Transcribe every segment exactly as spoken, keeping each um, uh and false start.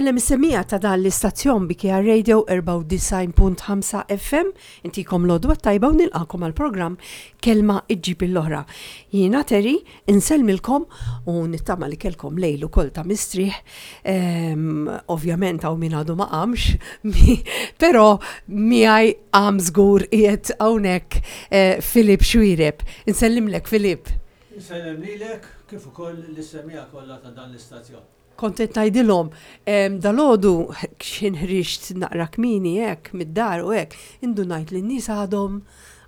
Insellem is-semmiegħa ta' dan l-istazzjon B K R Radio erbgħa u disgħin punt ħamsa F M, intikom l-għodwa t-tajba u nilqakom għal-programm Kelma Iġġib l-Oħra. Jiena Terry, insellmilkom u nittama li kellkom lejl ukoll ta' mistrieħ. Ehm, ovvjament hawn min għadu ma qamx, però miegħi qam żgur, qiegħed hawnhekk eh, Filip Xuereb. Insellimlek, Filip. Insellem lilek kif ukoll lis-semmiegħa kollha ta' dan l-istazzjon. Kont qed ngħidilhom, dalgħodu x'ħin ħriġt naqra kmieni hekk mid-dar u hekk, indunajt li n-nies għadhom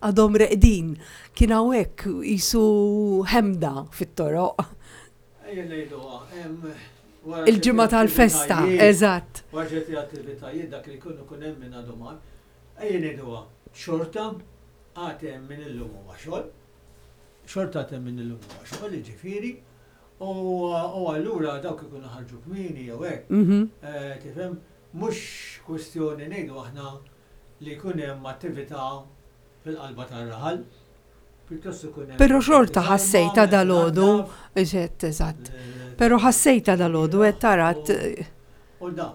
għadhom reqdin. Kien hawnhekk qisu ħemda fit-toroq. Ejja ngħiduha, wara Il-ġimgħa ċerti tal-festa, attivitajiet- eżatt. Wara ċerti attivitajiet dak li jkunu kun hemm minn għadu mar. Ejja ngħiduha, xorta għad hemm min illum huwa xogħol. Xorta għad hemm min illum huwa xogħol, jiġifieri. U u allura dawk ikunu ħarġu kmieni jew hekk. Mhm. Eh, Tifhem, mhux kwestjoni ngħidu aħna li jkun hemm attività fil-qalba tar-raħal. Pjuttost ikun hemm Però xorta ħassejta meta dalgħodu, tnaddaf, eżatt, eżatt. eh, Però ħassejta dalgħodu qed tarat U da,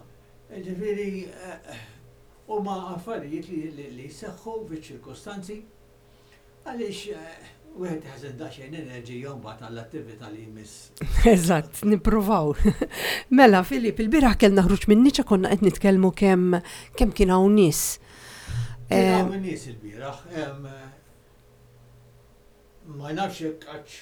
ġifieri, eh, huma affarijiet li, li, li jseħħu fiċ-ċirkostanzi għaliex eh, wieħed jaħżen daqsxejn enerġija mbagħad għall-attività li jmiss. Eżatt, nippruvaw. Mela, Filip, il-bieraħ kellna ħruġ minn niċa, konna qed nitkellmu kemm kemm kien hawn nies. Kien Eh, hawn in-nies il-bieraħ, em, ma nafx jekk għax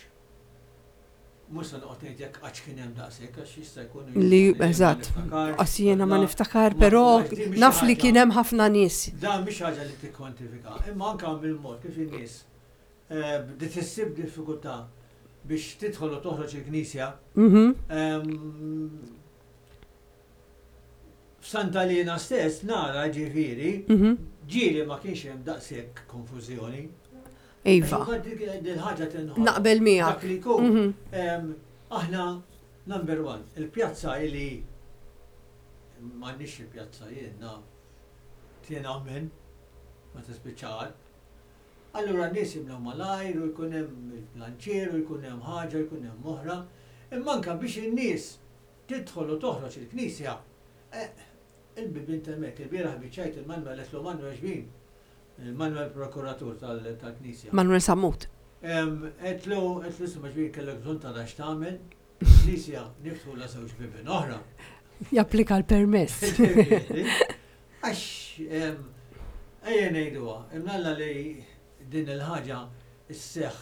mhux se noqgħod ngħid jekk għax kien hemm daqshekk, għax jista' jkun Li, ma eżatt, niftakarx, Qas jiena ma la- niftakar, ma- però għax din mhix naf li ħaġa- kien hemm ħafna nies. Dan mhix ħaġa li tikkwantifika, imma anke mill-mod kif in-nies eh, bdiet issib diffikultà biex tidħol u toħroġ il-knisja. Mhm. Ehm, F'Santa Lina stess nara, ġifieri, Mhm. ġieli ma kienx hemm daqshekk konfużjoni. Iva, Għax dik il-ħaġa tinħoloq. Naqbel miegħek. Dak li jkun. Mhm. Em, Aħna number one, il-pjazza li m'għandniex, il-pjazza jiena tiena minn ma tispiċċar. Allura n-nies jimlew malajr u jkun hemm il-planċier u jkun hemm ħaġa, jkun hemm oħra. Imma anke biex in-nies tidħol u toħroġ il-knisja, eh, il-bibien t'hemmhekk, il-bieraħ biċċajt il-Manuel, għedtlu, "Manuel, xbin?" Il-Manuel prokuratur tal- tal-knisja. Manuel Sammut. Em, Għedtlu, għedtlu, "Isma', xbin, kellek bżonn ta' x'tagħmel, knisja niftħu la żewġ bibien oħra." Japplika l-permess. Għax, em, ejja ngħiduha, imnalla li din il-ħaġa isseħ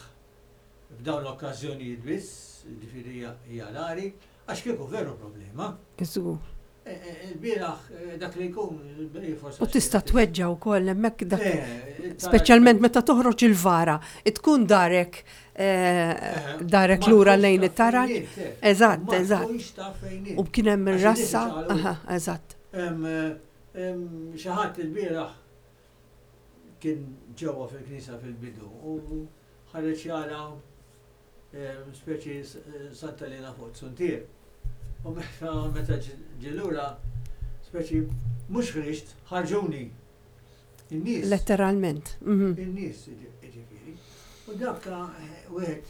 f'dawn l-okkażjonijiet biss, ġifieri hija- hija rari, għax kieku veru problema. Żgur. E- e- Il-bieraħ eh, dak li jkun, il- forsi U tista' tweġġa wkoll hemmhekk dak. Eh, Speċjalment meta toħroġ il-vara, tkun darek eh, darek ma lura tkunx lejn taf it-taraġ. fejn int, eh. Eżatt, Ma eżatt. tkunx taf fejn int. U kien hemm Għax ir-rassa. in-nies iċaqalqu. Aha, eżatt. Em, em, Xi ħadd il-bieraħ kien ġewwa fil-knisja fil-bidu u ħareġ jara em, speċi s- Santa Lena fuq Suntier. U meta meta ġie lura, speċi mhux ħriġt, ħarġuni. In-nies. Letteralment. Mhm. In-nies, ġifieri. U dak eh, wieħed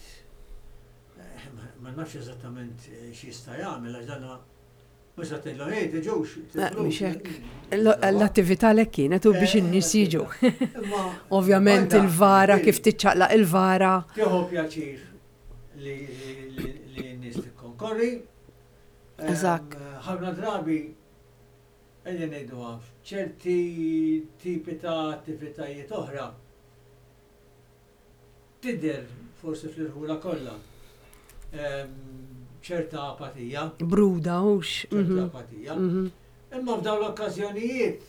eh, ma- ma nafx eżattament eh, x'jista' jagħmel, għax dana mhux se tgħidlu, "Ej, tiġux." Eh, mhux hekk. L- L-attività lek kienet u biex in-nies jiġu. Imma Ovvjament banda, il-vara, ġifieri, kif tiċċaqlaq il-vara. Tieħu pjaċir li li- li n-nies tikkonkorri. Em, Eżatt. Ħafna drabi ejja ngħiduha, f'ċerti tipi ta' attivitajiet oħra tidher forsi fl-irħula kollha em, ċerta apatija, Bruda, hux. ċerta Mhm. apatija. Mhm. Imma f'dawn l-okkażjonijiet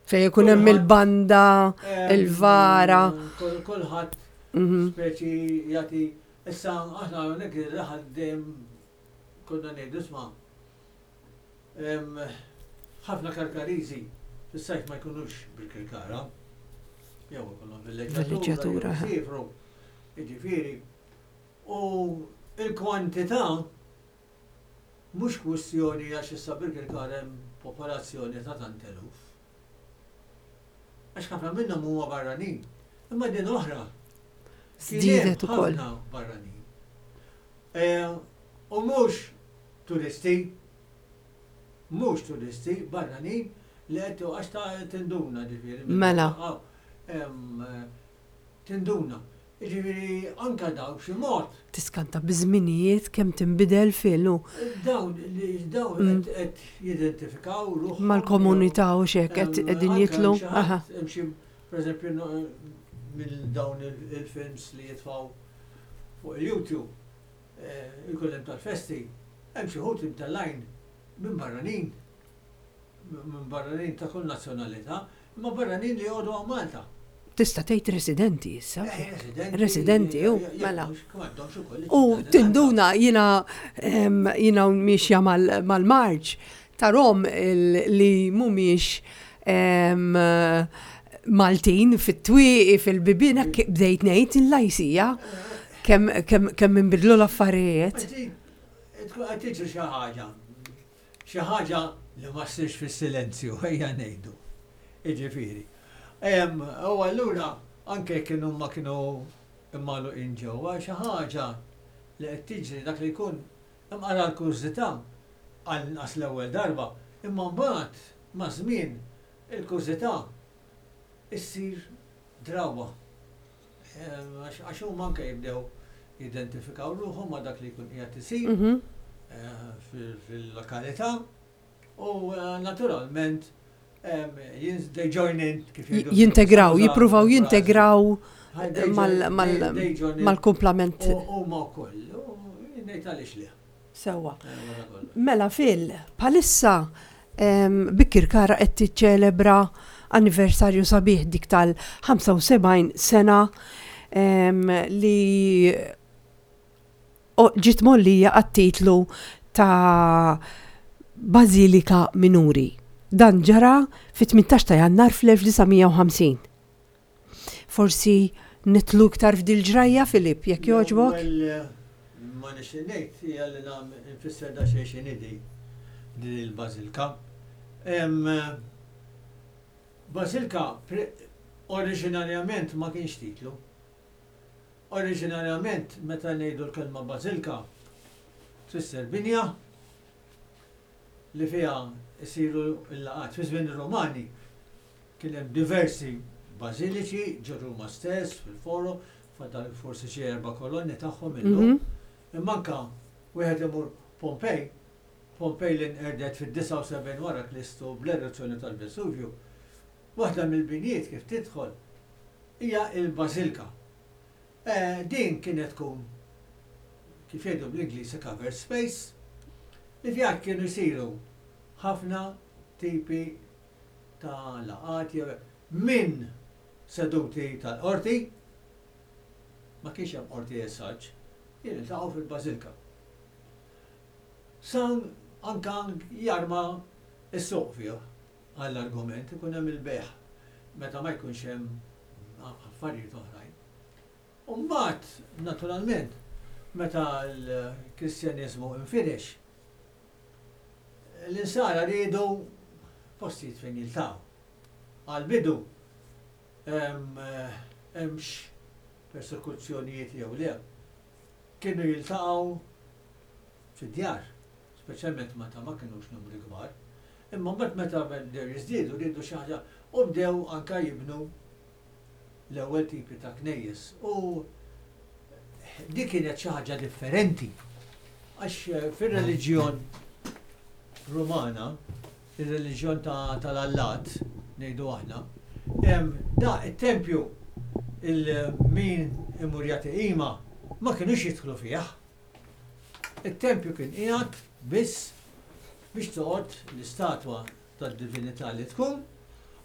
Fejn ikun hemm Kulħadd- il-banda, em, il-vara. kol- Kulħadd Mhm. speċi jagħti. Issa aħna hawnhekk ir-raħal dejjem konna ngħidu, isma', em, ħafna Karkariżi fis-sajf ma jkunux bil-Kirkara. Jew ikollhom Villeġġatura, villeġġatura, aha. jew jsiefru. Jiġifieri. U il-kwantità mhux kwistjoni, għax issa bil-Kirkara hemm popolazzjoni ta' tant eluf. Għax ħafna minnhom huma barranin. Imma din oħra. Kien hemm Żdiedet ukoll. ħafna barranin. Eh, U mhux turisti. Mhux turisti, barranin li qed għax ta' tinduna ġifieri. Mela. Em, eh, Tinduna. Ġifieri anka daw b'xi mod Tiskanta biż-żminijiet kemm tinbidel filu dawn li dawn qed qed jidentifikaw ruħhom mal-komunità u xek qed Em, qegħdin anke jitlu. hemm xi ħadd- Aha. hemm xi, Per eżempju, no- minn dawn il- il-films li jitfaw fuq il-YouTube, eh, ikun hemm tal-festi, hemm xi wħud imtellgħin minn barranin, minn barranin ta' kull nazzjonalità, imma barranin li jgħodu għaw Malta. Tista' tgħid residenti issa. Eh, Residenti. Residenti, u, jekk mela. mhux- kemm għandhomx ukoll U iċ-ċittadinanza. tinduna jina em, jina miexja mal-marċ tarom il- li mhumiex em, Maltin fit-twieqi fil-bibien hekk bdejt ngħid il-lajsija kemm kemm kemm inbidlu l-affarijiet. Għaddi, tkun qed tiġri xi ħaġa. Xi ħaġa li ma ssirx fis-silenzju, ejja ngħidu. Jiġifieri. Em, U allura anke kienu ma kienu immaluqin ġewwa xi ħaġa li qed tiġri dak li jkun imqara l-kurżità għal inqas l-ewwel darba, imma mbagħad ma' żmien il-kurżità issir drawwa. Em, Għax għax huma anke jibdew jidentifikaw ruħhom ma' dak li jkun qiegħed isir Mhm. eh, fil- fil-lokalità u eh, naturalment em, jins- they join in kif jgħidu. Jintegraw, Skuża, jippruvaw frażi. jintegraw They join- mal- mal- they- they join in. mal-kumplament U huma wkoll, u ngħid għaliex le. sewwa. Eh, wara kollox. Mela Phil, bħalissa em, Birkirkara qed tiċċelebra anniversarju sabiħ dik tal-ħamsa u sebgħin sena em, li o- ġiet mgħollija għat-titlu ta' Bażilika Minuri. Dan ġara fit-tmintax ta' Jannar fl-elf disa' mija u ħamsin. Forsi nidħlu iktar f'dil ġrajja, Filip, jekk jogħġbok? L-ewwel, eh, ma nixtieq ngħid hija li nagħmel nfisser da xejn x'inhi din il-bażilka. Em, eh, Bażilka pre- oriġinarjament ma kienx titlu. Oriġinarjament meta ngħidu l-kelma bażilka tfisser binja li fiha jsiru l-laqgħat. Fi żmien ir-Romani kien hemm diversi bażiliċi ġo Ruma stess, fil-foro, fadal forsi xi erba' kolonni tagħhom illum. Mhm. Imma anka wieħed imur Pompej, Pompej li nqerdet fid-disgħa u sebgħin wara Kristu bl-eruzzjoni tal-Vesuvju, waħda mill-binjiet kif tidħol hija il-Bażilka. Eh, din kienet tkun kif jgħidu bl-Ingliż covered space li fiha kienu jsiru ħafna tipi ta' laqgħat jew minn seduti tal-qorti, ma kienx hemm qorti essaġ, jiltaqgħu fil-bażilka. San anka jarma s-suq fih għall-argument ikun hemm il-bejgħ meta ma jkunx hemm affarijiet oħrajn. U mbagħad, naturalment, meta l-Kristjaniżmu infirex, l-insara riedu postijiet fejn jiltaqgħu. Għal-bidu hemmx persekuzzjonijiet jew le, kienu jiltaqgħu fid-djar, speċjalment meta ma kinux numri kbar. Imma mbagħad meta bdew jiżdiedu riedu xi ħaġa u bdew anka jibnu l-ewwel tipi ta' knejjes. U dik kienet xi ħaġa differenti. Għax eh, fir-reliġjon Rumana, ir-reliġjon tal-Allat, ngħidu aħna, da it-tempju il-min imur jagħti qima ma kienux jidħlu fih. Il-tempju kien qiegħed biss biex toqgħod l-istatwa tad-divinità li tkun,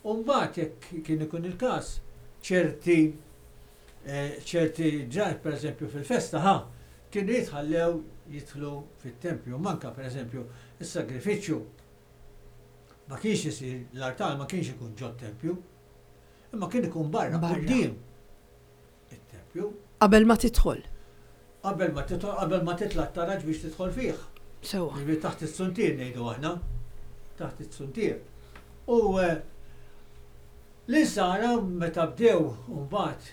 u mbagħad jekk kien ikun il-każ ċerti eh, ċerti ġar, per eżempju fil-festa, ħa, kienu jitħallew jidħlu fit-tempju. Manka per eżempju is-sagrifiċċju ma kienx isir, l-artal ma kienx ikun ġo tempju, imma kien ikun barra, Barra. quddiem it-tempju. Qabel ma tidħol. Qabel ma tidħol, qabel ma titla' t-taraġ biex tidħol fih. Sewwa. Ġifieri taħt is-suntier ngħidu aħna, taħt is-suntier. U eh, l-insara meta bdew mbagħad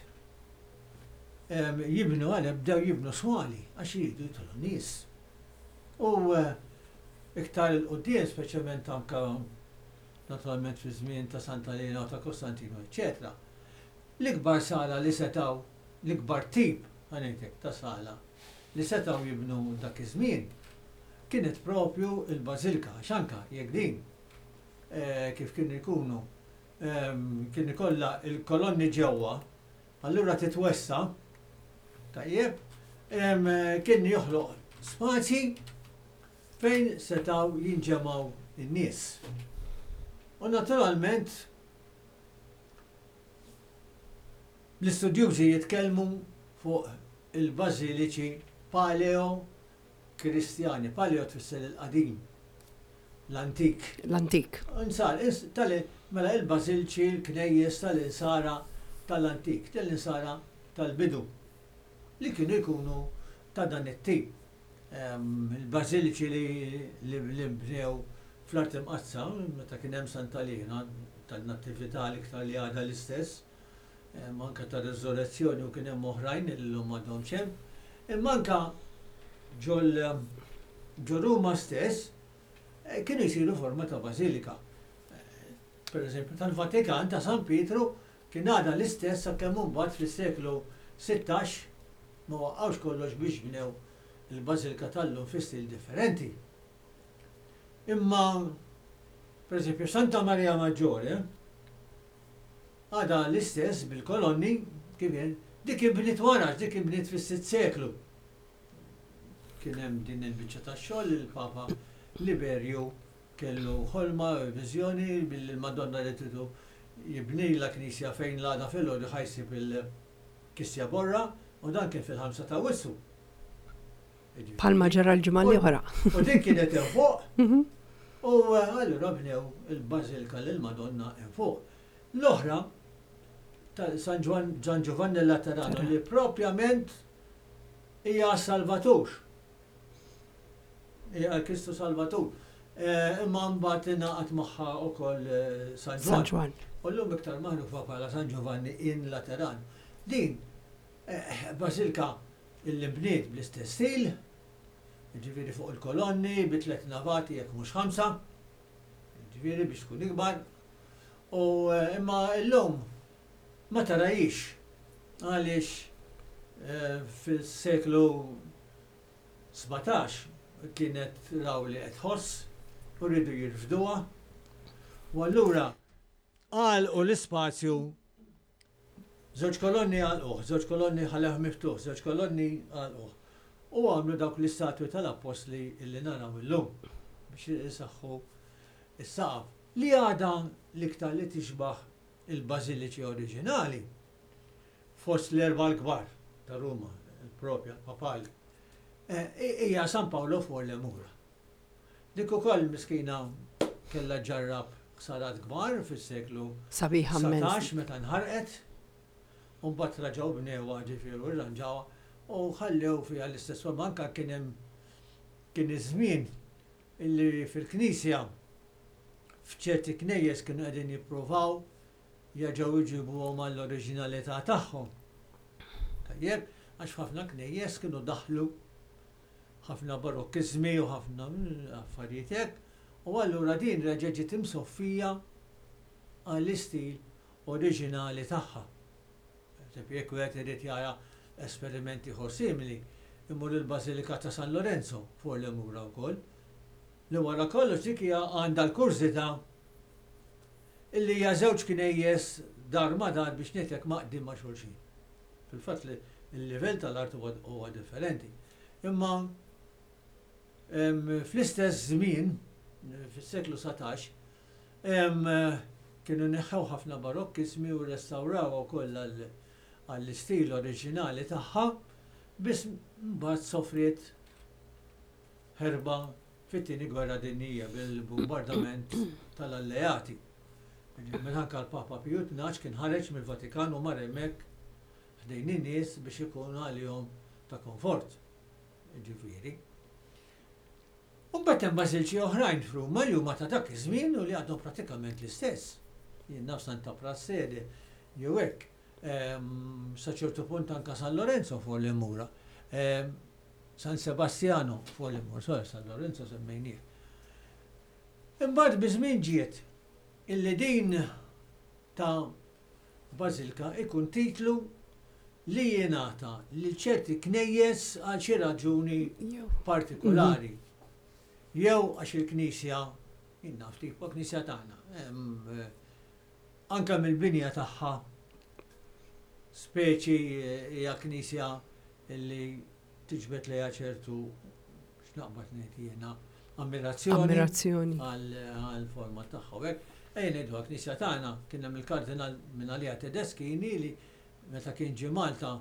em, jibnu għale bdew jibnu swali għax jridu jidħlu nies. U eh, Iktar 'il quddiem, speċjalment anka naturalment fi żmien ta' Santa Elena u ta' Kostantino, eċċetera. L-ikbar sala li setgħu, l-ikbar tip, ħa ngħidlek, ta' sala li setgħu jibnu dak iż-żmien kienet propju il-bażilka, għax anka jekk din eh, kif kienu jkunu ehm, kien ikollha il-kolonni ġewwa, allura titwessa, tajjeb, em, kien joħloq spazji fejn setgħu jinġemgħu in-nies. U naturalment l-istudjużi jitkellmu fuq il-bażiliċi paleo-Kristjani. Paleo tfisser il-qadim, l-antik. L-antik. Insar, ins- tal mela il-bażilċi, il-knejjes tal-insara tal-antik, tal-insara tal-bidu, li kienu jkunu ta' dan it-tip. Ehm, Il-bażiliċi li li li bnew fl-Art Imqaddsa, meta kien hemm Santa Lina, tan-Natività l-iktar li għadha l-istess, ehm, anka ta' Resurrezzjoni u kien hemm oħrajn li llum m'għadhomx hemm. Imma anka ġol ġo Ruma stess eh, kienu jsiru forma ta' bażilika. Eh, Per eżempju, tal-Vatikan ta' San Pietru kien għadha l-istess sakemm imbagħad fis-seklu sittax ma waqqgħux kollox biex bnew il-bażilika tal-lum fi stil differenti. Imma, per eżempju, Santa Maria Maggiore għadha l-istess bil-kolonni kif kien, dik inbniet wara, dik inbniet fis-sitt seklu. Kien hemm din il-biċċa tax-xogħol li l-Papa Liberju kellu ħolma, viżjoni billi l-Madonna li tridu jibnila knisja fejn l-għada filgħodu ħa jsib il-kisja borra u dan kien fil-ħamsa ta' Awwissu. Palma ġara l-ġimgħa l-oħra. U din kienet hemm fuq. U eh, allura bnew il-Bażilika lil Madonna hemm fuq. L-oħra ta' San Ġwan San Giovanni Laterano li propjament hija Salvatur. Hija Kristu Salvatur. Eh, Imma mbagħad ingħaqad magħha wkoll eh, San San Ġwan. Ġwan. U llum iktar magħrufa bħala San Giovanni in Lateran. Din eh, bażilika illi bniet bl-istess stil, ġifieri fuq il-kolonni, bi tliet navati jekk mhux ħamsa, ġifieri biex tkun ikbar. U eh, imma llum ma tarahiex għaliex eh, fis-seklu sbatax kienet raw li qed tħoss u rridu jirfduha. U allura għalqu l-ispazju, żewġ kolonni għalquh, żewġ kolonni ħallew miftuħ, żewġ kolonni għalquh. U għamlu dawk l-istatwi tal-appostli illi naraw illum biex jisaħħu is-saqaf. Li għadha l-iktar li tixbaħ il-bażiliċi oriġinali fost l-erba l-kbar ta' Ruma, il-propja, papali, eh, hija San Paolo fuq l-Mura. Dik ukoll miskina kellha ġarrab ħsarat kbar fis-seklu Sabiħa immens. satax meta nħarqet, u mbagħad raġgħu bnewha ġifieri u rranġawha u ħallew fiha l-istess forma. Anka kien hemm kien iż-żmien illi fil-knisja f'ċerti knejjes kienu qegħdin jippruvaw jerġgħu jġibuhom għall-oriġinalità tagħhom. Tajjeb, għax ħafna knejjes kienu daħlu ħafna barokkizmi u ħafna affarijiet hekk, u allura din reġgħet ġiet imsoffija għall-istil oriġinali tagħha. Eżempju, jekk wieħed irid jara esperimenti ieħor simili, imur il-Bażilika ta' San Lorenzo fuq l-Mura wkoll. Li wara kollox dik hija għandha l-kurżità illi hija żewġ knejjes dar ma dar biex ngħidlek maqdim ma' xulxin. Fil-fatt li l-livell tal-art huwa huwa differenti. Imma em, fl-istess żmien, fis-seklu satax, em, kienu neħħew ħafna barokkismi u restawraw ukoll għall- għall-istil oriġinali tagħha, biss mbagħad sofriet ħerba fit-tieni gwerra dinjija bil-bombardament tal-alleati. Meta anke l-Papa Piju Tnax kien ħareġ mill-Vatikan u mar hemmhekk ħdejn in-nies biex ikun għalihom ta' komfort. Ġifieri. U mbagħad hemm bażilċi oħrajn f'Ruma li huma ta' dak iż-żmien u li għadhom pratikament l-istess. Jien naf Santa Prassede jew hekk. Ehm, sa ċertu punt anka San Lorenzo fuq l-Mura. Ehm, San Sebastiano fuq l-Mura, sorry, San Lorenzo semmejnieh. Imbagħad biż-żmien ġiet illi din ta' bażilka ikun titlu li jingħata lil ċerti knejjes għal xi raġuni partikolari. Jew għax il-knisja, jien naf, tipo knisja tagħna, em, eh, anka mill-binja tagħha speċi eh, hija knisja li tiġbed lejha ċertu, x'naqbad ngħid jiena, ammirazzjoni Ammirazzjoni. Għal-forma tagħha. U hekk, ejja ngħidu knisja tagħna kien hemm il-kardinal minn għalija Tedeschini li meta kien ġie Malta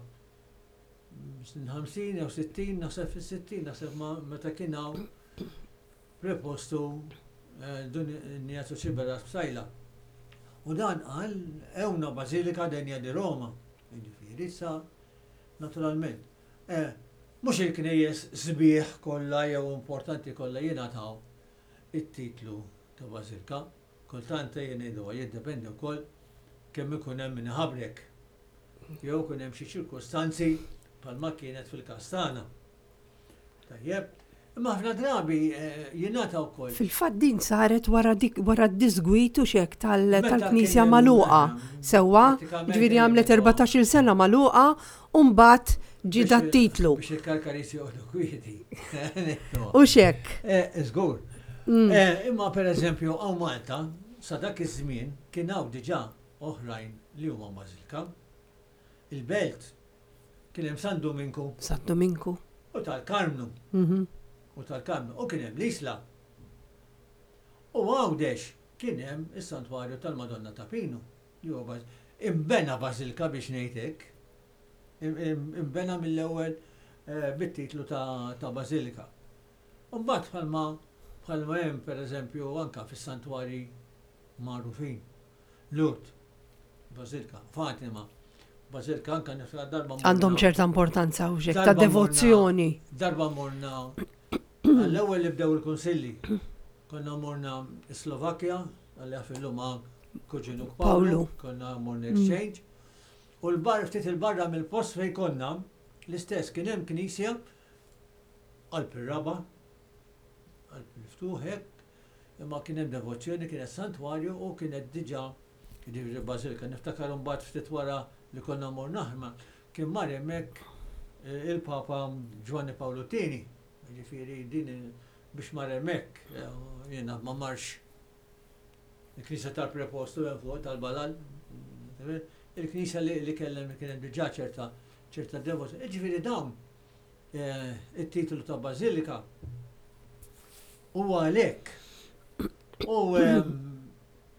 snin ħamsin jew sittin, naħseb fis-sittin, naħseb ma meta kien hawn prepostu eh, Dun Ignazio Sciberras Psaila. U dan qal "È una basilica degna di Roma". Jiġifieri issa naturalment. Eh, mhux il-knejjes sbieħ kollha jew importanti kollha jingħataw it-titlu ta' bażilka. Kultant ejja ngħidu jiddependi wkoll kemm ikun hemm min iħabrek. Jew ikun hemm xi ċirkustanzi bħalma kienet fil-każ tagħna. Tajjeb, imma ħafna drabi eh, jingħata wkoll. Fil-fatt din saret wara dik wara d-disgwit u xek tal- Meta tal-knisja kien hemm, magħluqa. eh, Sewwa, pratikament ġifieri għamlet ejja, erbatax-il sena magħluqa u mbagħad ġie biex- dat-titlu. Biex il-Karkaris joqogħdu kwieti. U xek. Eh, Żgur. Mm. Eh, Imma per eżempju, hawn Malta, sa dak iż-żmien kien hawn diġà oħrajn li huma bażilka. Il-Belt kien hemm San Dominku San Dominku. U tal-Karmnu Mhm. u tal-Karmnu u kien hemm l-Isla. U Għawdex kien hemm is-Santwarju tal-Madonna ta' Pinu, li huwa baż- imbena bażilka biex ngħid hekk. Im- im- Imbena mill-ewwel eh, bit-titlu ta' ta' bażilika. U mbagħad bħalma bħalma hemm pereżempju anka fis-santwarji magħrufin. Lourdes, Bażilika, Fatima, Bażilika, anka niftakar darba morna- Għandhom ċerta importanza u xek ta' Darba morna- devozzjoni. Darba morna, għall-ewwel li bdew il-kunsilli, konna morna Slovakkja, għalli għafillu ma' kuġinuk Paolo, Paolo. konna morna exchange, u l-bar, ftit il-barra mill-post fej konna, l-istess kien hemm knisja qalb ir-raba', qalb il-ftuħ hekk, imma kien hemm devozzjoni, kienet santwarju u kienet diġà jiġifieri bażilika. Niftakar mbagħad ftit wara li konna morna aħna, kien mar hemmhekk eh, il-Papa Giovanni Paolo Tieni, jiġifieri din il- biex mar hemmhekk, eh, jiena ma marx il-knisja tal-prepostu hemm fuq tal-Balal, il-knisja li, li kellem kienet diġà ċerta ċerta devozzjoni. Jiġifieri dawn eh, it-titlu ta' bażilika huwa għalhekk. U ehm,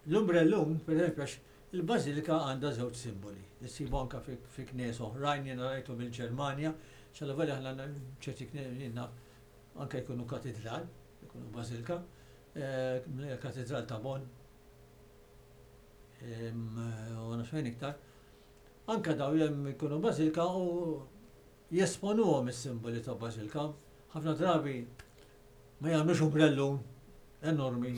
l-umbrellum, per eżempju, għax il-bażilika għandha żewġ simboli. Issibu anka fi, fi knies oħrajn, jiena rajtu mill-Ġermanja, xalla aħna ċerti knies jiena anka jkunu katedral, jkunu bażilika, eh, katedral ta' Bonn, em, u naf fejn iktar. Anka daw jem jkunu bażilika u jesponuhom is-simboli ta' bażilika. Ħafna drabi ma jagħmlux umbrellun enormi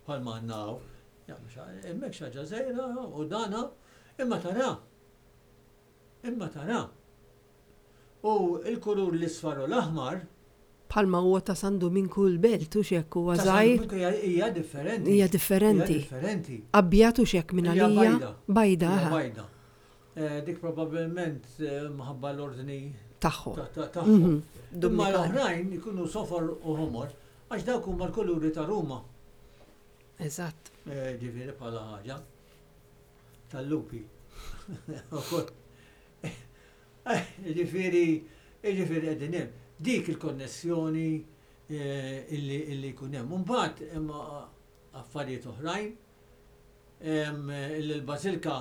bħal ma għandna hawn. Jagħmlu xa- hemmhekk xi ħaġa żgħira u dana imma tara. Imma tara. U il-kulur l-isfar u l-aħmar Bħalma huwa ta' San Dominku l-Belt u xek huwa ta' San żgħir. Dominku hija hija differenti. Hija differenti. Hija differenti. Abjad u xek minn Hija għalija. bajda. Bajda, Hija aha, bajda. Eh, Dik probabbilment eh, minħabba l-ordni tagħhom. ta- ta- tagħhom. Mhm. Imma Dominikani. l-oħrajn ikunu sofor u ħomor, għax dawk huma l-kuluri ta' Ruma. Eżatt. Eh, Ġifieri bħala ħaġa tal-lupi. Eh, Ġifieri, ġifieri qegħdin hemm. Dik il-konnessjoni eh, illi illi jkun hemm. Mbagħad imma affarijiet oħrajn em, illi l-bażilka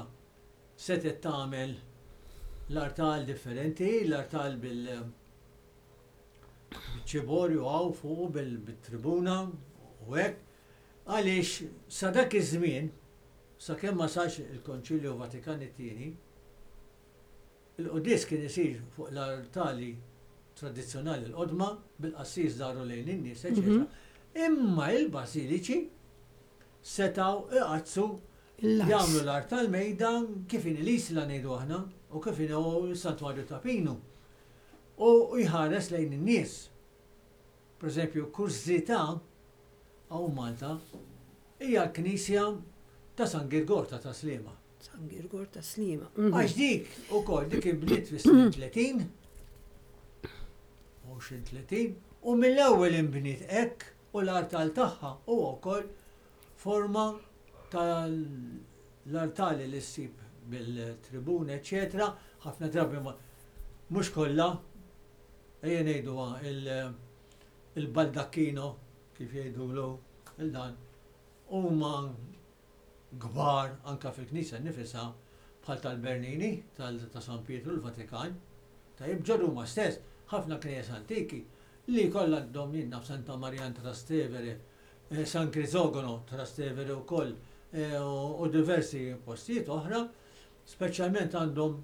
setet tagħmel l-artal differenti, l-artal bil ċiborju hawn fuq bil-tribuna u hekk. Għaliex sa dak iż-żmien, sakemm ma sarx il-Konċilju Vatikan it-tieni, il-quddies kien isir fuq l-artali tradizzjonali l-qodma bil-qassis dahru lejn in-nies, eċetera. Imma il-basiliċi setaw iqaddsu Il-las. jagħmlu l-artal mejda kif in l-Isla ngħidu aħna u kif in s-Santwarju ta' Pinu. U jħares lejn in-nies. Per eżempju, kurżità hawn Malta Hija l-Knisja ta' San Girgor ta' Tas-Sliema. San Girgor ta' Sliema. Għax dik ukoll dik inbniet fis-snin tletin, għoxrin tletin, u mill-ewwel inbniet hekk u l-artal tagħha huwa wkoll forma tal-artali li ssib bil-tribuna, eċetera. Ħafna drabi ma mhux kollha, ejja ngħidu il-baldacchino kif jgħidulu il-dan, huma kbar anka fil-knisja nifisha bħal tal-Bernini, ta' San Pietru l-Vatikan. Tajjeb, ġo Ruma stess, ħafna knejjes antiki li kollha għandhom, jien naf, Santa Maria Trastevere, eh, San Crisogono Trastevere wkoll eh, u diversi postijiet oħra, speċjalment għandhom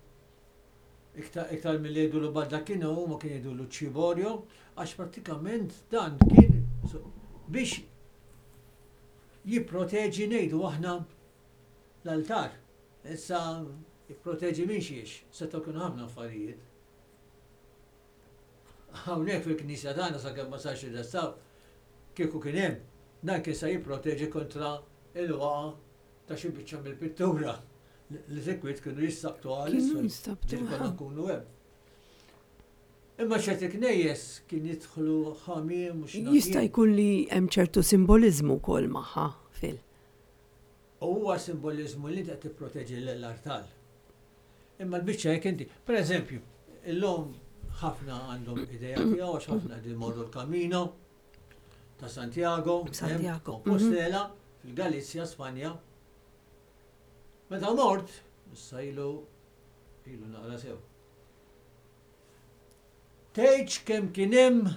iktar mill-li jgħidulu baldacchino, huma kien jgħidulu ċiborio, għax prattikament dan kien biex jipproteġi, ngħidu aħna, l-altar. Issa jipproteġi minn xiex, setgħu kienu ħafna affarijiet. Hawnhekk fil-knisja tagħna, sakemm ma sarx ir-restawr, kieku kien hemm, dan kien se jipproteġi kontra il-waqa ta' xi biċċa mill-pittura li sikwit kienu jissabtu għal Kienu jissabtu, konna nkunu hemm. Imma ċerti knejjes kien jidħlu ħamiem u x'naf Jista' jien. jkun li hemm ċertu simboliżmu wkoll magħha, Phil. U huwa simbolizmu li qed tipproteġi l-artal. Imma l-biċċa jekk inti, per eżempju, illum ħafna għandhom idea tiegħu għax ħafna qegħdin imorru l-Camino ta' Santiago, Santiago, Compostela, fil-Galizja, Spanja. Meta mort, issa ilu ilu naqra sew. Tgħidx kemm kien hemm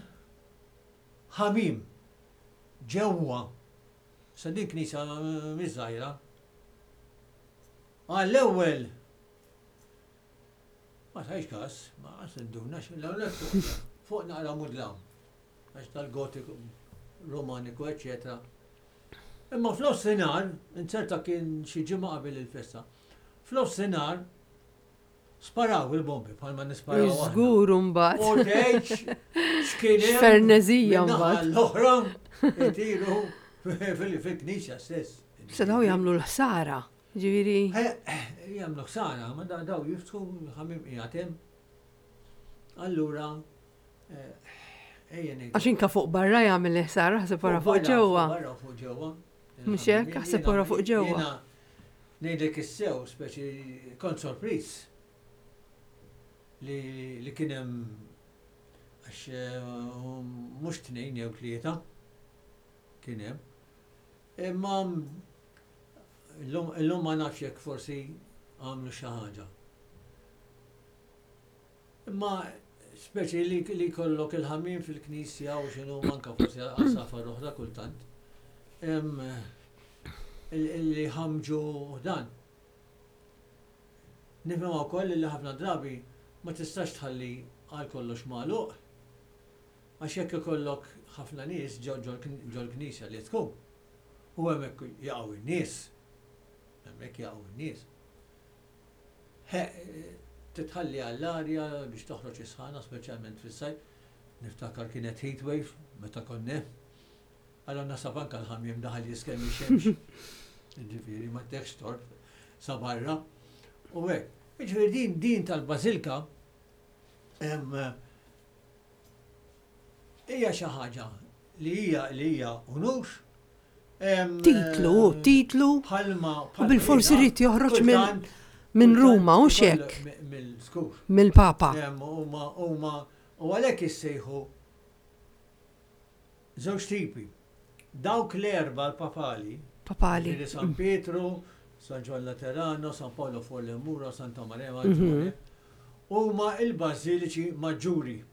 ħamiem ġewwa. Sa din knisja mhix żgħira. Għall-ewwel ma tajx każ, ma qas induna l-ewwel fuq fuq naqra mudlam. Għax tal-Gotiku, Romaniku, eċetera. Imma f'nofsinhar, inzerta kien xi ġimgħa qabel il-festa. F'nofsinhar sparaw il-bombi bħalma nisparaw aħna. Żgur mbagħad. U tgħidx x'kien hemm X'ferneżija min-naħa mbagħad. l-oħra jtiru fil-knisja stess. Se daw jagħmlu l-ħsara. Ġifieri Eh, eh, Jagħmlu ħsara, ma da- daw jiftħu ħamiem qiegħed hemm. Allura, eh, ejja ngħidu. Għax inka fuq barra jagħmel l-ħsara, ħseb wara fuq barra, ġewwa. Fuq barra fuq ġewwa. Mhux hekk, ħseb wara fuq ġewwa. Jiena ngħidlek is-sew, speċi kont sorpriż li li kien hemm, għax eh, mhux tnejn jew tlieta kien hemm. Imma illum illum ma nafx jekk forsi għamlu xi ħaġa. Imma speċi li, li kollok il-ħamiem fil-knisja u x'inhu, manka forsi għasafar oħra kultant. Em, il- Li ħamġu dan. Nifhem ukoll li ħafna drabi ma tistax tħalli għal kollox magħluq. Għax jekk ikollok ħafna nies ġo ġol-knisja li tkun. U hemmhekk jaqgħu in-nies. Hemmhekk jaqgħu in-nies. Titħalli għall-arja biex toħroġ is-sħana, speċjalment fis-sajf. Niftakar kienet heat wave meta konna. Allora nasab anka l-ħamiem daħal jiskem ix-xemx. Ġifieri ma tekx tort sa barra. U hekk. Ġifieri din din tal-Bażilka em, hija xi ħaġa li hija li hija unur. Em, Titlu, titlu. Bħalma U bil-forsi rrid joħroġ minn kultant- minn kultant Ruma u ikollok xek mi- Mill-skur. mill-Papa. Em, Huma huma u għalhekk issejħu żewġ tipi. Dawk l-erba l-papali, Papali. ġifieri San Pietru, San Ġwann Laterano, San Paolo fuori le Mura, Santa Maria Maggiore, huma il-bażiliċi maġġuri,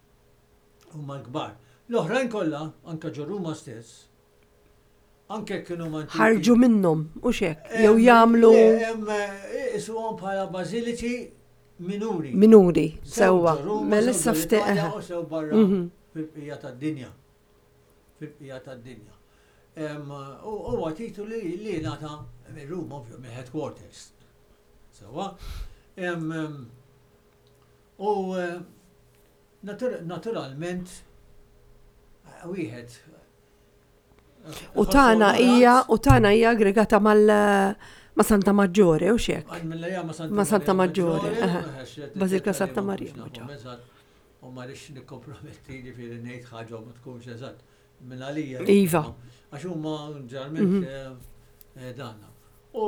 huma l-kbar. L-oħrajn kollha, anka ġo Ruma stess, anke kienu antiki. Ħarġu minnhom u xek. Jew jagħmlu Isuhom bħala bażiliċi minuri. Minuri. Sew Sewwa. ġo Ruma, Mela sew issa ġo fte- l-Italja eħe. u sew barra Mhm. fil-bqija tad-dinja. Fil-bqija tad-dinja. Em, U huwa titlu li li ngħata minn Ruma, ovvju, minn headquarters. Sewwa. Em, em, U eh, natur- naturalment eh, wieħed U tagħna hija u tagħna hija aggregata mal ma' Santa Maggiore u xek. Ma' Santa Maggiore, Bażilika Santa Maria Maggiore. U ma rridx nikkomprometti, ġifieri ngħid ħaġa u ma tkunx eżatt. Minn għalija. Iva. Għax huma ġeneralment mhm. eh, danna. U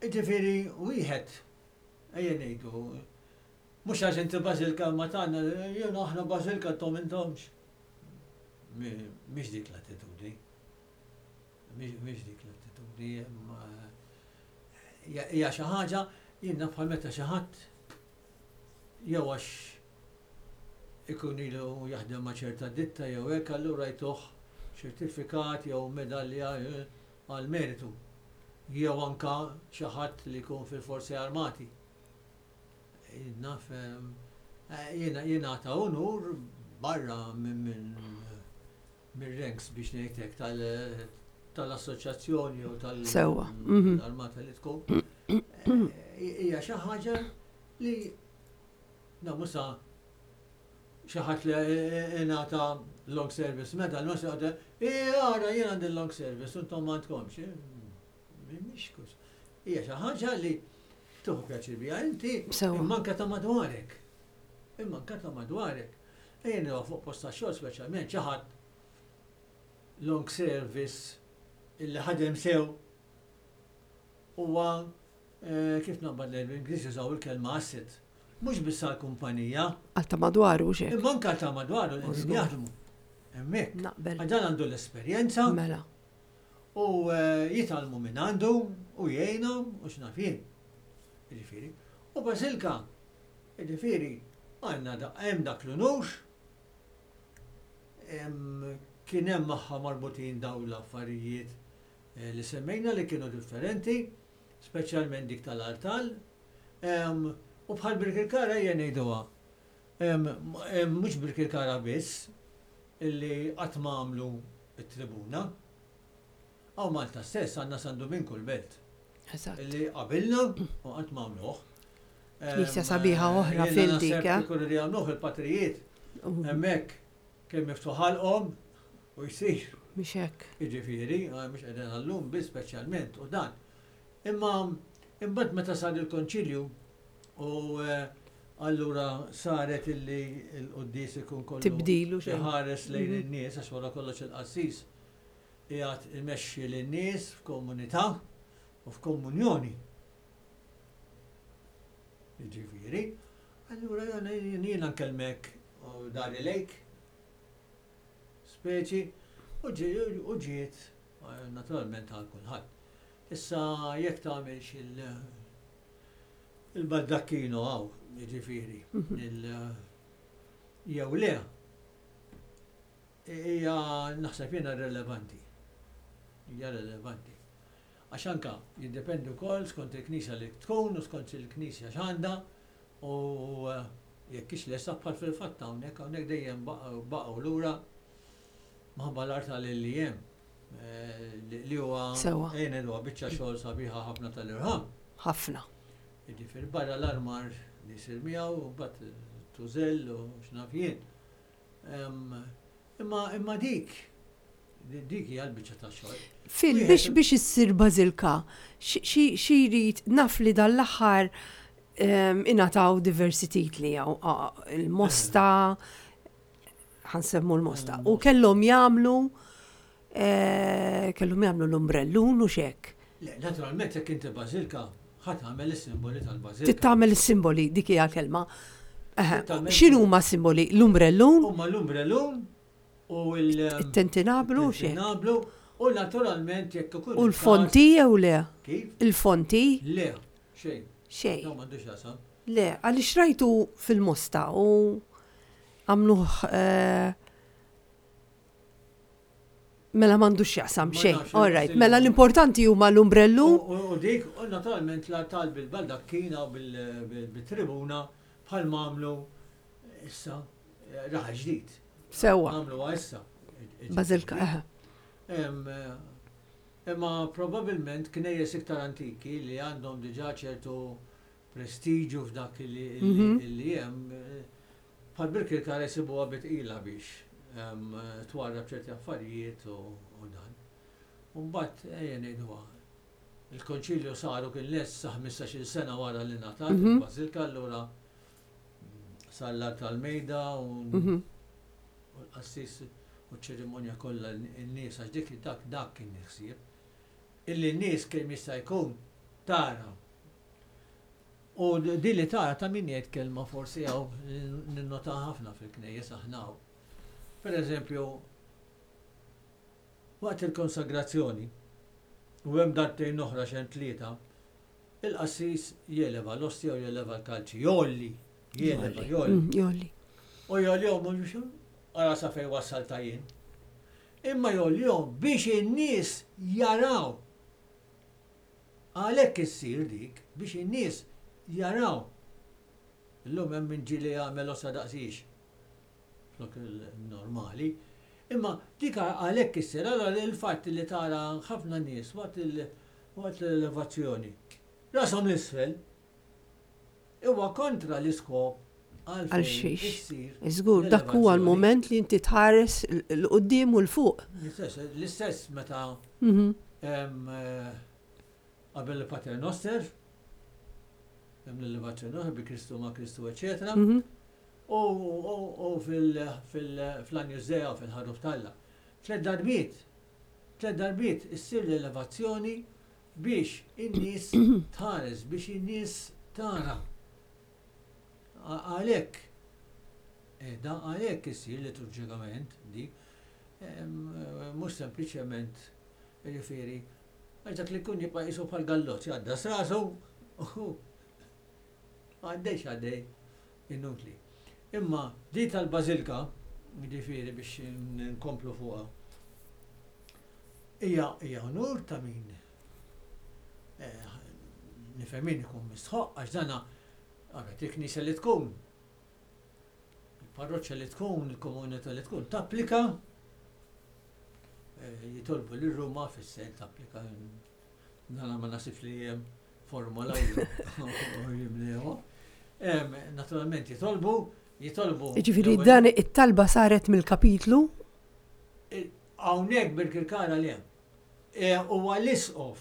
ġifieri wieħed ejja ngħidu mhux għax inti bażilka ma tagħna, jiena aħna bażilka intom intomx. Mhix dik l-attitudni. Mhix dik l-attitudni. Hija xi ħaġa jien naf bħal meta xi ħadd jew għax ikun ilu jaħdem ma' ċerta ditta jew hekk, allura jtuh ċertifikat jew medalja eh, għal meritu. Jew anka xi ħadd li jkun fil-forzi armati. Naf eh, jiena jingħata unur barra minn mir-ranks biex ngħidlek tal-assoċjazzjoni jew Sewwa. Mhm. tal-armata li tkun. Eh, hija xi ħaġa li na musa xi ħadd li ingħata long service medal, ma se jgħid, ara jien għandi long service, intom ma għandkomx. Mhix kus. Hija xi ħaġa li tieħu pjaċir biha inti, Sewwa. imma anke ta' madwarek. Imma anke ta' madwarek. Ejja fuq post ta' xogħol speċjalment xi ħadd long service illi ħadem sew huwa eh, kif naqbad l Ingliż jużaw il-kelma asset. Mhux biss għall-kumpanija, Għal ta' madwaru xek. imma anke ta' madwaru li qegħdin Żgur. jaħdmu. Hemmhekk. Naqbel. Dan għandu l-esperjenza Mela. u eh, jitgħallmu minn għandu u jgħinhom u x'naf jien. Jiġifieri. U bażilka, jiġifieri, għandna da- hemm dak l-unur, hemm- kien hemm magħha marbutin dawn l-affarijiet eh, li semmejna li kienu differenti, speċjalment dik tal-artal. Em, U bħal Birkirkara ejja ngħiduha. Em, em, Mhux Birkirkara biss illi qatt ma għamlu it-tribuna. Hawn Malta stess għandna San Duminku l-Belt Eżatt. illi qabilna u qatt ma għamluh. Knisja sabiħa oħra Jiena fil naħseb dik, eh? kieku li għamluh il-patrijiet U hemmhekk kemm miftuħ ħalqhom u jsir. Mhix hekk. Jiġifieri, eh, mhux qegħdin għallum biss speċjalment u dan. Imma imbagħad meta sar il-konċilju u eh, allura saret illi l-quddies ikun kollu Tibdilu xejn. iħares lejn Mhm. in-nies għax wara kollox il-qassis qiegħed imexxi lin-nies f'komunità u f'komunjoni. Jiġifieri, allura jena jiena nkellmek u dari lejk, speċi, u ġi- u ġiet eh, naturalment għal kulħadd. Issa jekk tagħmilx il- il-baldacchino hawn, jiġifieri, il- jew le, hija naħseb jiena relevanti. Hija relevanti. Għax anka jiddependi wkoll skont il-knisja li tkun u skont il-knisja x'għandha u eh, jekk hix lesta bħal fil-fatt hawnhekk hawnhekk dejjem baqgħu baqgħu lura minħabba l-art li hemm eh, li li huwa Sewwa. ejja ngħiduha biċċa xogħol sabiħa ħafna tal-irħam. Ħafna. Jiġifieri barra l-armar li jsir miegħu u mbagħad tużell u x'naf jien. Em, Imma imma dik dik hija l-biċċa tax-xogħol. Fil Wieħed- biex biex issir bażilka, xi xi jrid naf li dal-aħħar em, ingħataw diversi titli hawn il-Mosta, ħa nsemmu l-Mosta, u kellhom jagħmlu eh, kellhom jagħmlu l-umbrellun u xek. Le, naturalment jekk inti bażilka, ħa tagħmel is-simboli tal-bażilka. Tittamel is-simboli, dik hija kelma. Eħe, Tittamel- X'inhuma simboli? L-umbrellun, Huma l-umbrellun u l- it-tintinnablu u xek. tintinablu u naturalment jekk ikun U l-fonti jew le? Kif? Il-fonti? Le, xejn. Xejn. No, m'għandux jasam. Le, għaliex rajtu fil-Mosta u għamluh eh, mela m'għandux jaqsam Ma xejn. nafx, All right, il- mela l-importanti huma l-umbrellu. U u dik, u naturalment l-artal bil-baldakkina u bil- bil- bil-tribuna bħal għamlu issa eh, raħal ġdid. Sewwa, Għamlu issa. bażilka, eħe. Em, eh, Imma probabilment knejjes iktar antiki li għandhom diġà ċertu prestiġu f'dak li Mhm. li hemm, eh, bħal Birkirkara jsibuha bi tqila biex Twarrab ċerti affarijiet u dan. U mbagħad ejja ngħiduha, il-konċilju saru kien lest sa ħmistax-il sena wara li ngħatat Mhm. il-Bażilka, allura sar tal-mejda u Mhm. u l-qassis u ċ-ċerimonja kollha n-nies, għax dik dak dak kien il-ħsieb. Illi n-nies kemm jista' jkun tara. U di li tara ta' min jgħid kelma forsi hawn ninnota ħafna fil-knejjes aħna hawn. Per eżempju, waqt il-konsagrazzjoni, u hemm darbtejn oħra xejn tlieta, il-qassis jeleva l-ostja u jeleva l-kalċi, jgħolli, jeleva, jgħolli. Mm, Jgħolli. U jgħollihom mhux ara sa fejn wassal ta' jien. Imma jgħollihom biex in-nies jaraw. Għalhekk issir dik biex in-nies jaraw. Illum hemm min ġieli jagħmel ostja daqsix. Flok il-normali. Imma dik għalhekk issir, allora il-fatt li tara ħafna nies waqt il- waqt l-elevazzjoni rashom 'l isfel huwa kontra l-iskop Għal għalfejn xiex. issir Żgur, dak huwa l-elevazzjoni. l-moment li inti tħares 'l quddiem u 'l fuq. L-istess, l-istess meta Mhm. hemm eh, qabel il-Pater Noster, hemm l-elevazzjoni oħra bi Kristu ma' Kristu, eċetera. Mhm. U, u, u fil-Agnus Dei u fil-Ħaruf t'Alla. Tliet darbiet, tliet darbiet issir l-elevazzjoni biex in-nies tħares, biex in-nies tara. A- Għalhekk, eh, da għalhekk issir liturġikament di, em, eh, mhux sempliċement jiġifieri, għax dak li jkun jibqa' qisu bħal gallot, jgħaddas rasu, u għaddej x'għaddej, inutli. Imma di tal-Bażilka, jiġifieri biex nkomplu fuqha, hija hija onur ta' min eh, nifhem min ikun mistħoq għax dana għaret il-knisja li tkun, il-parroċċa li tkun, il-komunità li tkun, tapplika, eh, jitolbu lil Ruma fis-sens tapplika, dana ma nasibx li hemm formola u jimlewha. Em, Naturalment jitolbu, jitolbu. Jiġifieri l-ewwel- dan it-talba saret mill-kapitlu. Hawnhekk Birkirkara li hemm. E, Huwa l-isqof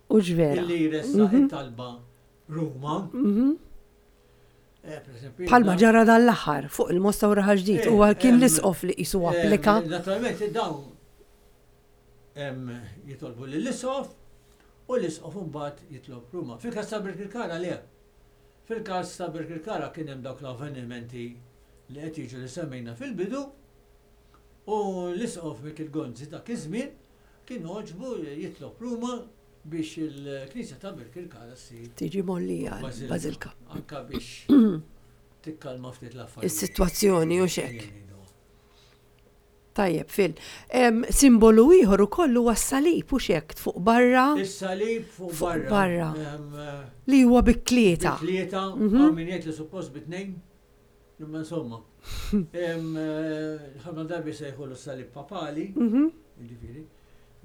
U ġvera. illi jressaq it-talba Ruma. Mhm. Eh, per esempio, Bħalma da- ġara dan l-aħħar fuq il-Mosta u Raħal Ġdid, Eh, huwa kien em, l-isqof li qisu em, applika. Naturalment, dawn em, jitolbu lill-isqof u l-isqof mbagħad jitlob Ruma. Fil-każ ta' Birkirkara le. Fil-każ ta' Birkirkara kien hemm dawk l-avvenimenti li qed jiġu li semmejna fil-bidu u l-isqof Mikiel Gonzi dak iż-żmien kien għoġbu jitlob Ruma biex il-Knisja ta' Birkirkara ssir Tiġi mgħollija Bażilka. Bażilka. Anka biex tikkalma ftit l-affarijiet. Is-sitwazzjoni u xek. Ejja ngħidu. Tajjeb, Phil. Em, Simbolu ieħor ukoll huwa s-salib u xek fuq barra Is-salib fuq Fuq barra. barra. Em, eh, li huwa bi tlieta. Bi tlieta, Mhm. hawn min jgħid li suppost bi tnejn, imma insomma. Em, eh, Ħafna drabi sejħulu s-salib papali, Mhm. jiġifieri.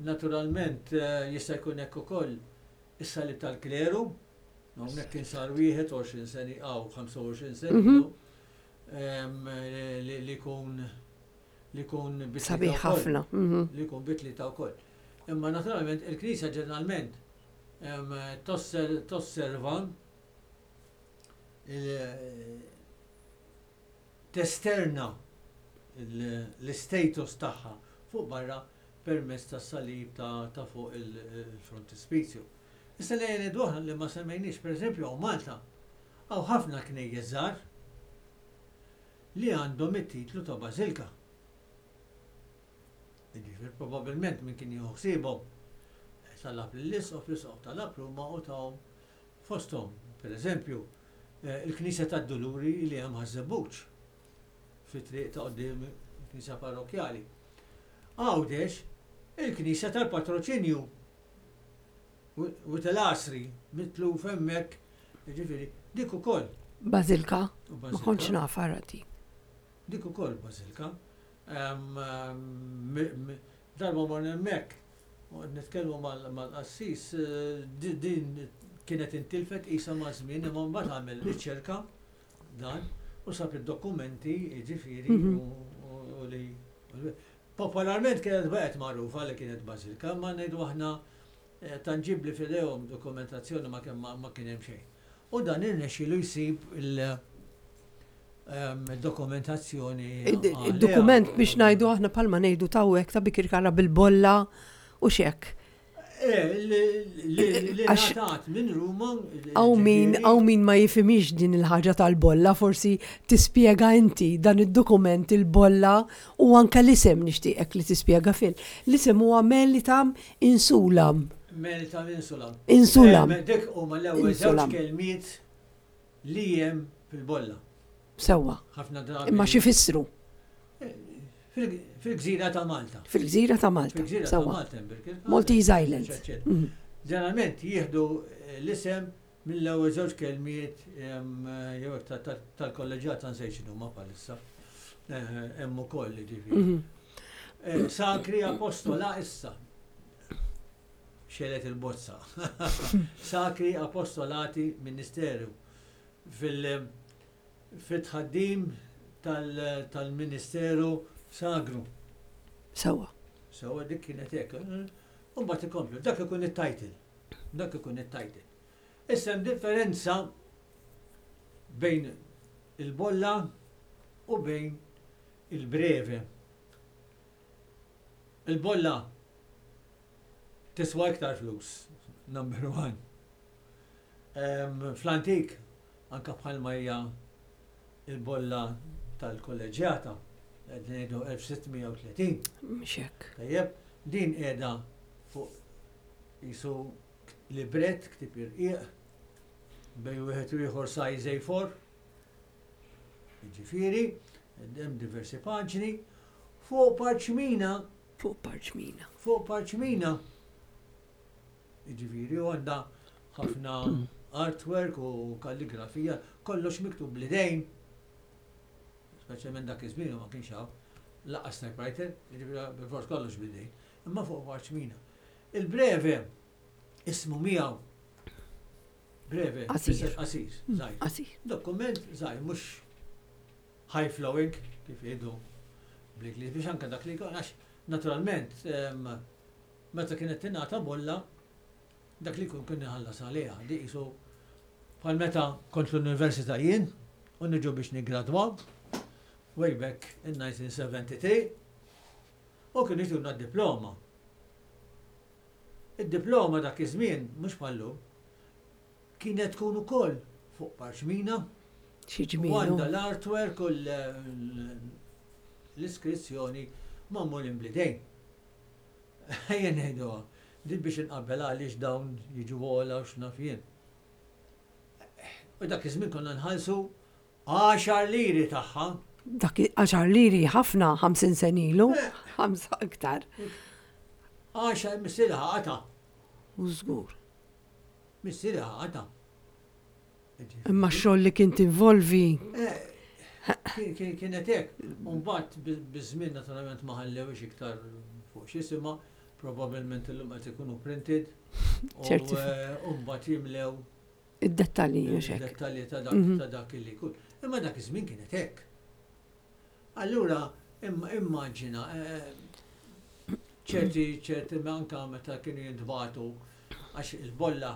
Naturalment eh, jista' jkun hekk ukoll is-salib tal-kleru, hawnhekk kien sar wieħed għoxrin sena aw ħamsa u għoxrin sena Mhm. ilu, em, li li jkun li jkun bi tlieta Sabiħ wkoll. ħafna. Mhm. Li jkun bi tlieta wkoll. Imma naturalment il-Knisja ġeneralment em, tosser- tosserva il- testerna il- l-status tagħha fuq barra permezz tas-salib ta' ta' fuq il-frontispizju. Issa li ngħidu aħna li ma semmejniex, pereżempju hawn Malta, hawn ħafna knejjes żgħar li għandhom it-titlu ta' bażilka. Jiġifieri probabbilment min kien jieħu ħsiebhom talab lill-isqof, l-isqof talab Ruma u tahom fosthom, per eżempju, eh, il-Knisja tad-Duluri li hemm Ħaż-Żebbuġ fi triq ta' quddiem il-Knisja Parrokkjali. Għawdex, il-Knisja tal-Patroċinju u tal-Asri mitluf hemmhekk, jiġifieri, dik ukoll. Bażilka. U Ma bażilka. kontx naf arati. Dik ukoll bażilka. Em, em, mi- mi- Darba morna hemmhekk, u nitkellmu mal- mal-qassis, eh, di- din kienet intilfet isa ma' żmien, imma mbagħad għamel riċerka dan u sab id-dokumenti, jiġifieri, Mhm. u- u u li Popolarment kienet baqgħet magħrufa li kienet bażilika, ma ngħidu aħna eh, tanġibli f'idejhom dokumentazzjoni ma kien ma kien hemm xejn. U dan irnexxielu jsib il-dokumentazzjoni. Il-dokument biex ngħidu aħna palma ngħidu tawwek ta' Bikirkara bil-bolla u xek. Eh, li ngħatat minn Ruma. Hawn min, hawn min ma jifhimx din il-ħaġa tal-bolla, forsi tispjega inti dan id-dokument il-bolla u anka l-isem nixtieqek li tispjega fil. L-isem huwa Melitam Insulam. Melitam Insulam. Insulam. Eh, dik huma l-ewwel żewġ kelmiet li hemm fil-bolla. Sewwa. Ħafna drabi. Imma x'ifissru? Fil-gżira ta' Malta. Fil-gżira ta' Malta. Fil-gżira ta' Malta. Maltese Island. Mhm. Ġeneralment jieħdu eh, l-isem mill-ewwel żewġ kelmiet jew tal-kolleġġjata nsejt x'inhuma bħalissa. Eh, hemm ukoll ġifieri. Mhm. Eh, Sacri Apostola issa. Xelet il-bozza. Sacri Apostolati Ministeru fil- fit-tħaddim tal-Ministeru Sagru. Sewwa. Sewwa dik kienet hekk. U mbagħad ikomplu, dak ikun it-title. Dak ikun it-title. Issa hemm differenza bejn il-bolla u bejn il-breve. Il-bolla tiswa iktar flus, number one. Fl-antik, anka bħalma hija il-bolla tal-kolleġjata, qed ngħidu elf sitt mija u tletin. Mhux hekk. Tajjeb, din qiegħda fuq jisu libret, ktib irqiq, bejn wieħed u ieħor size A four. Jiġifieri, hemm diversi paġni, fuq parċmina, Fuq parċmina. Fuq parċmina. Jiġifieri, u għandha ħafna artwork u kalligrafija, kollox miktub bl-idejn. Speċjalment dak iż-żmien ma kienx hawn lanqas typewriter, jiġifieri bil-fors kollox bl-idejn, imma fuq parċmina. Il-breve ismu miegħu. Breve, Qasir. fisser qasir, żgħir. Qasir. Dokument żgħir, mhux high flowing kif jgħidu bl-Ingliż biex anke dak li jkun, għax naturalment em, meta kienet tingħata bolla dak li jkun kien iħallas għaliha, di qisu bħal meta kont l-università jien u niġu biex niggradwaw way back in nineteen seventy-three u kienu jtuna d-diploma. Id-diploma dak iż-żmien mhux bħallum kienet tkun ukoll fuq parċmina Xi u ġmielu. għandha l-artwork u l- l-iskrizzjoni magħmulin bl-idejn. Ejja ngħidu, din biex inqabbel għaliex dawn jiġu ogħla u x'naf jien. U dak iż-żmien konna nħallsu għaxar liri tagħha. Dak għaxar liri ħafna ħamsin sena ilu, ħamsa iktar. Għaxar missieri qata. U żgur. Missieri qata. Imma x-xogħol li kien tinvolvi. Eh, kien- kien- Kienet hekk. Mbagħad biż-żmien naturalment ma ħallewx iktar fuq x'isimha, probabbilment illum qed ikunu printed. U Ċertif- eh, u mbagħad jimlew Id-dettalji mhux hekk. id-dettalji ta' dak Mhm. ta' dak li jkun. Imma dak iż-żmien kienet hekk. Allura imma immaġina eh, ċerti ċerti anka meta kienu jintbagħtu għax il-bolla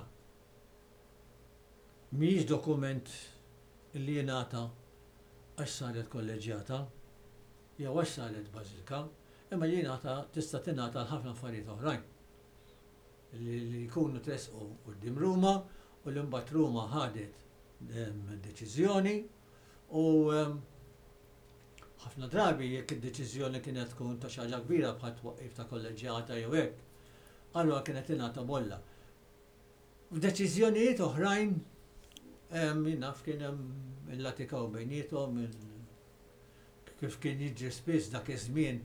mhijiex dokument li jingħata għax saret kolleġjata jew għax saret bażilika, imma jingħata tista' tingħata għal ħafna affarijiet oħrajn li li jkunu tresqu quddiem Ruma u li mbagħad Ruma ħadet em, deċiżjoni u em, ħafna drabi jekk id-deċiżjoni kienet tkun ta' xi ħaġa kbira bħal twaqqif ta' kolleġjata jew hekk, allura kienet ingħata bolla. F'deċiżjonijiet oħrajn em, jien naf kien hemm il-latikaw bejniethom il- kif kien jiġri spiss dak iż-żmien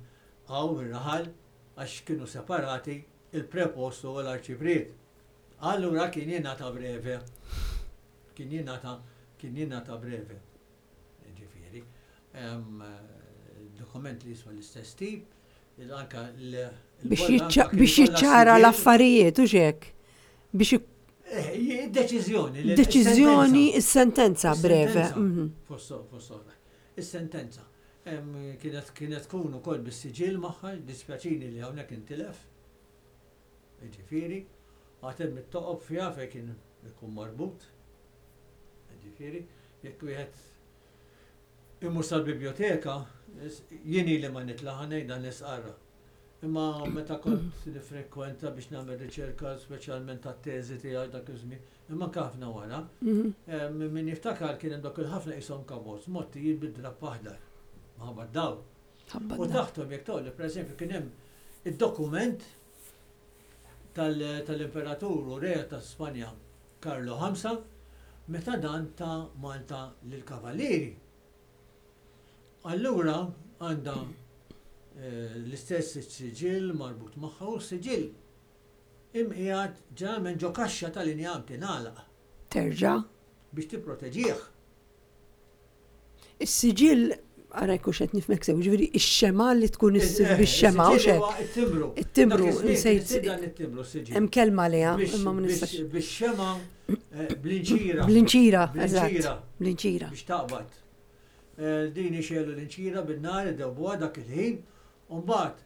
hawn ir-raħal għax kienu separati il-prepostu u l-arċipriet. Allura kien jingħata breve. Kien jingħata kien jingħata breve. Ġifieri, hemm, eh, dokument li jiswa l-istess tip, il- anka l- Biex il-bolla anka jiċċa- kien biex ikollha jiċċara siġill. l-affarijiet u xek. Biex ik- Eh, id-deċiżjoni. li- deċiżjoni, is-sentenza. is-sentenza breve. Is-sentenza. Mhm. Fost fost oħra. Is-sentenza. Kienet kienet tkun ukoll bis-siġill magħha, dispjaċini li hawnhekk intilef. Ġifieri, għad hemm it-toqob fiha fejn kien ikun marbut. Ġifieri, jekk wieħed imur sal-biblioteka, jien li ma nitlaħ ngħid nisqarra. Imma meta kont nifrekwenta biex nagħmel riċerka, speċjalment tat-teżi tiegħi dak iż-żmien, imma anke ħafna wara, Mhm. min jiftakar kien hemm dak il-ħafna qishom cupboards, mgħottijin bid-drapp aħdar. Minħabba dawl. Ħabba U dawl. taħthom jekk tolli, pereżempju, kien hemm id-dokument tal-imperatur u re ta' Spanja Karlo ħamsa meta dan ta Malta lill-Kavallieri. Allura għandha eh, l-istess siġill marbut magħha u siġill imqiegħed ġeneralment ġo kaxxa tal-injam tingħalaq Terġa'. Biex tipproteġih. Is-siġill, ara jkun qed nifhmek sew, ġifieri ix-xema li tkun issir bix-xema u xek. It-timbru. It-timbru, Dak iż-żmien insejt- kien isir dan it-timbru siġill. Hemm kelma liha, Biex- imma ma nistax. biex- Biex xema eh, bl-inċira. Bl-inċira, eżatt. Bl-inċira. Bl-inċira. Biex taqbad. Eh, Din ixegħlu l-inċira bin-nar, idewbuha dak il-ħin, u mbagħad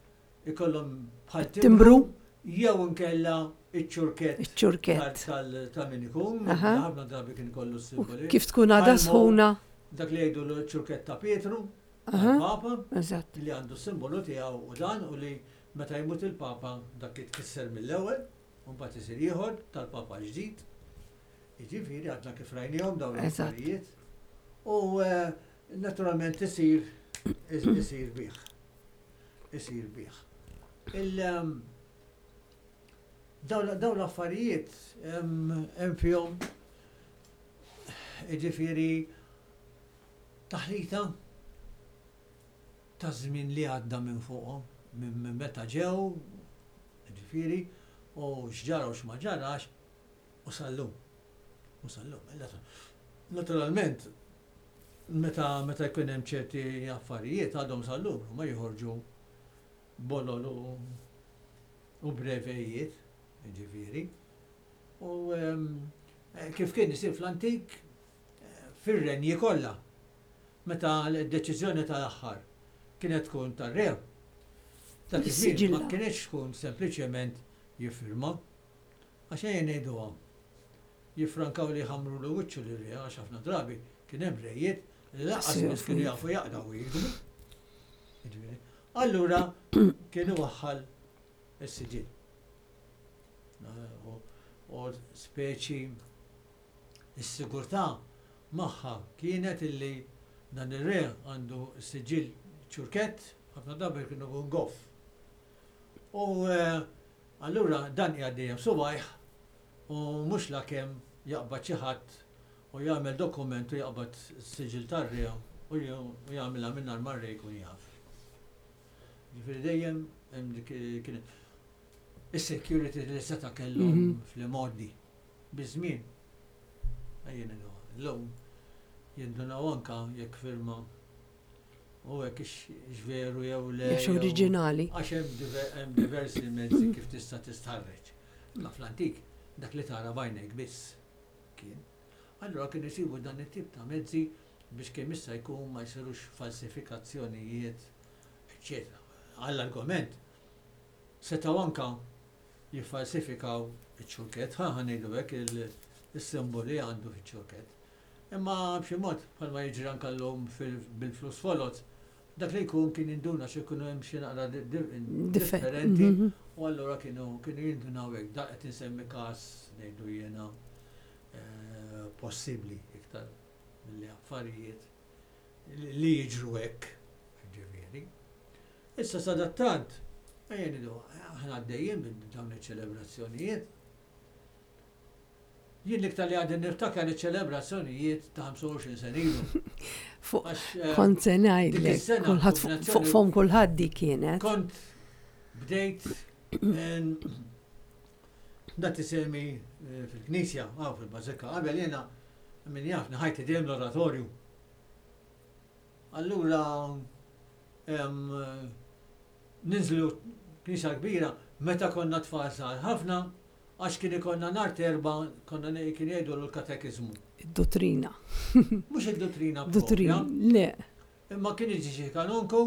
ikollhom bħal Timbru. Jew inkella iċ-ċurkett. Iċ-ċurkett. tal- Ta' min ikun, Aha. ħafna drabi kien ikollu U s-simboli. kif tkun għadha Bħal mo- sħuna. Dak li jgħidu l-ċurkett ta' Pietru, Aha. tal-Papa, Eżatt. li għandu simbolu tiegħu u dan u li meta jmut il-Papa dak jitkisser mill-ewwel, u mbagħad isir ieħor tal-Papa ġdid. Jiġifieri għadna kif rajnihom dawn Eżatt. l-affarijiet. U eh, naturalment isir isir bih. Isir bih. Il ehm, dawn dawn l-affarijiet hemm hemm fihom, jiġifieri, taħlita ta' żmien li għadda minn fuqhom, minn minn meta ġew, ġifieri, u x'ġara u x'ma ġarax, u sal-lum. U sal-lum. Naturalment, meta meta jkun hemm ċerti affarijiet għadhom sal-lum, ma joħorġu bolol u u brevejiet, ġifieri. U em, eh, kif kien isir fl-antik, eh, fir-renji kollha, meta l-deċiżjoni tal-aħħar kienet tkun tar-re. Dak iż-żmien ma Is-siġilla. kienx tkun sempliċement jiffirma. Għax ejja ngħiduhom. Jiffrankaw li ħamru l wiċċu li re, għax ħafna drabi kien hemm rejiet li lanqas biss kienu jafu jaqraw u jiktbu. Jiġifieri, allura kienu waħħal is-siġill. U- U speċi is-sigurtà magħha kienet illi dan ir-re għandu siġill ċurkett, ħafna drabi kienu jkun goff. U eh, allura dan qiegħed dejjem subajh u mhux la kemm jaqbad xi ħadd u jagħmel dokument u jaqbad siġill tar-re u j- u jagħmilha mingħajr ma r-re jkun jaf. Ġifieri dejjem hemm dik kienet is-security li seta' kellhom Mhm. fl-imgħoddi biż-żmien. Ejja ngħidu, llum jindunaw anka jekk firma u hekk ix veru jew le. Jekk jew- oriġinali. Għax hemm diver- hemm diversi mezzi kif tista' tistħarreġ. Imma fl-antik dak li tara b'għajnejk biss kien. Allura kien isibu dan it-tip ta' mezzi biex kemm issa jkun ma jsirux falsifikazzjonijiet, eċċetera. Għall-argument, setgħu anka jiffalsifikaw iċ-ċurkett, ħa ħa ngħidu hekk, il- il-simboli għandu fiċ-ċurkett. Imma b'xi mod bħalma jiġri anka llum fil- bil-flus foloz, dak li jkun kien jinduna xi jkunu hemm xi naqra di- di- Differ- differenti Mhm. u allura kienu kienu jindunaw hekk. Da qed insemmi każ, ngħidu jiena, eh, possibbli iktar milli affarijiet li li jiġru hekk, ġifieri. Issa sadattant, ejja ngħidu, aħna għaddejjin minn dawn iċ-ċelebrazzjonijiet. Jien l-iktar li għadni niftakar iċ-ċelebrazzjonijiet ta' ħamsa u għoxrin sena ilu. Fuq Għax, eh, kont se dik ngħidlek, is-sena kulħadd fuq kombinazzjoni- fuq fom kulħadd di kienet. Kont bdejt en, dat isemi eh, fil-knisja, għaw fil-bażilika, qabel jena min jafni ħajti dejjem l-oratorju. Allura em, eh, ninżlu knisja kbira meta konna tfal żgħar ħafna, għax kien ikollna nhar t'Erbgħa konna ne- kien jgħidu l-katekiżmu. Id-dottrina. Mhux id-dottrina Dottrina, propja, le. Imma kien jiġi xi kanonku,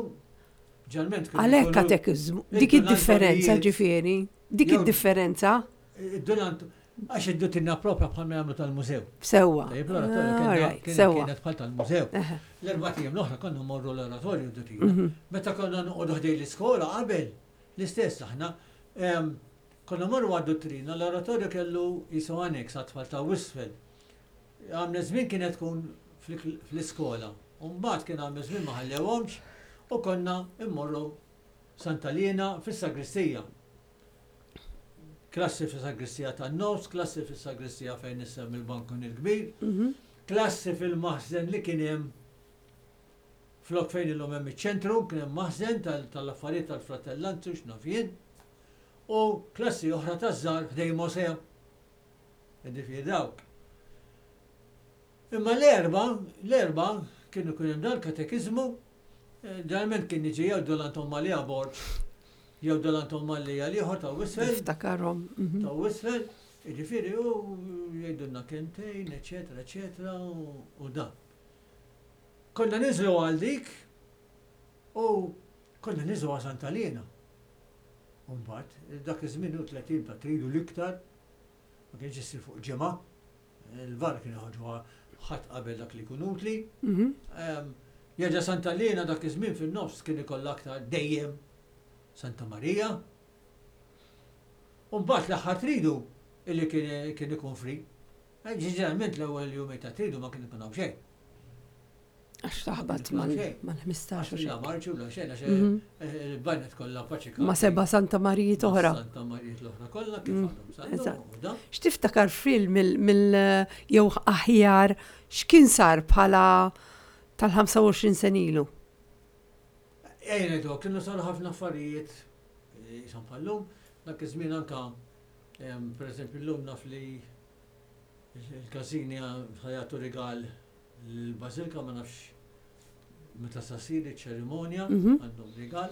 ġalment kien Għalhekk ikunu- katekiżmu, dik Id-Dun id-differenza Antonijiet. ġifieri, dik Jew- id-differenza Id-Dun Ant- għax id-duttrina propja bħal ma jagħmlu tal-mużew. sewwa. Tajjeb, l-oratorju Ah, kien- alright, kien- sewwa. kienet bħal tal-mużew. Eħe. L-erbat ijiem l-oħra konna mmorru l-oratorju d-duttrina. Mhm. Meta konna noqogħdu ħdejn l-iskola qabel, l-istess aħna, em, konna morru għad-duttrina, l-oratorju kellu jisu annex għat-tfal ta' Wisfel. Għamna żmien kienet tkun fl- fl-iskola. U mbagħad kien għamna żmien ma ħallewhomx u konna immorru Santa Lina fis-sagristija. Klassi fis-sagristija tan-nofs, klassi fis-sagristija fejn nisem il-bankun il-kbir, Mhm. klassi fil-maħżen li kien hemm flok fejn illum hemm iċ-ċentru, kien hemm maħżen tal- tal-affarijiet tal-fratellanzu x'naf jien, u klassi oħra taż-żgħar ħdejn Mosea. Jiġifieri dawk. Imma l-erba, l-erba kienu kien hemm dal-katekiżmu, eh, ġeneralment kien jiġi jew Dun Anton Mallia Borg, jew Dun Anton Mallia l-ieħor ta' Wisfel, Niftakarhom. mhm. ta' Wisfel, jiġifieri u jgħidulna kelmtejn, eċetera, eċetera, u u dan. Konna niżlu għal dik u konna niżlu għal Santa Lina. U mbagħad, dak iż-żmien u tletin ta' tridu l-iktar, ma kienx isir fuq ġimgħa, il-var kien joħorġu ħadd qabel dak li jkun utli. Mhm. Em, Jerġa' Santa Lina dak iż-żmien fin-nofs kien ikollha aktar dejjem Santa Marija. U mbagħad l-aħħar tridu illi kien kien ikun free. Eh, Ġeneralment l-ewwel jumej ta' tridu ma kien ikun hawn xejn. Għax taħbat Ma kien xejn. mal-ħmistax u Għax la xejn. marċu la xejn għax Mhm. eh, il-banet kollha paċika. Ma seba' Santa Marijiet oħra. Santa Marijiet l-oħra kollha kif Mm, għandhom sal eżatt. u dan. X'tiftakar film mill mill jew aħjar x'kien sar bħala tal-ħamsa u għoxrin sena ilu? Ejja ngħidu, kienu saru ħafna affarijiet eh, jisom bħallum, dak iż-żmien anka em, per eżempju llum naf li il-każini ħa jagħtu rigal l-Bażilka, ma nafx meta sa ssir iċ-ċerimonja, Mhm. għandhom rigal.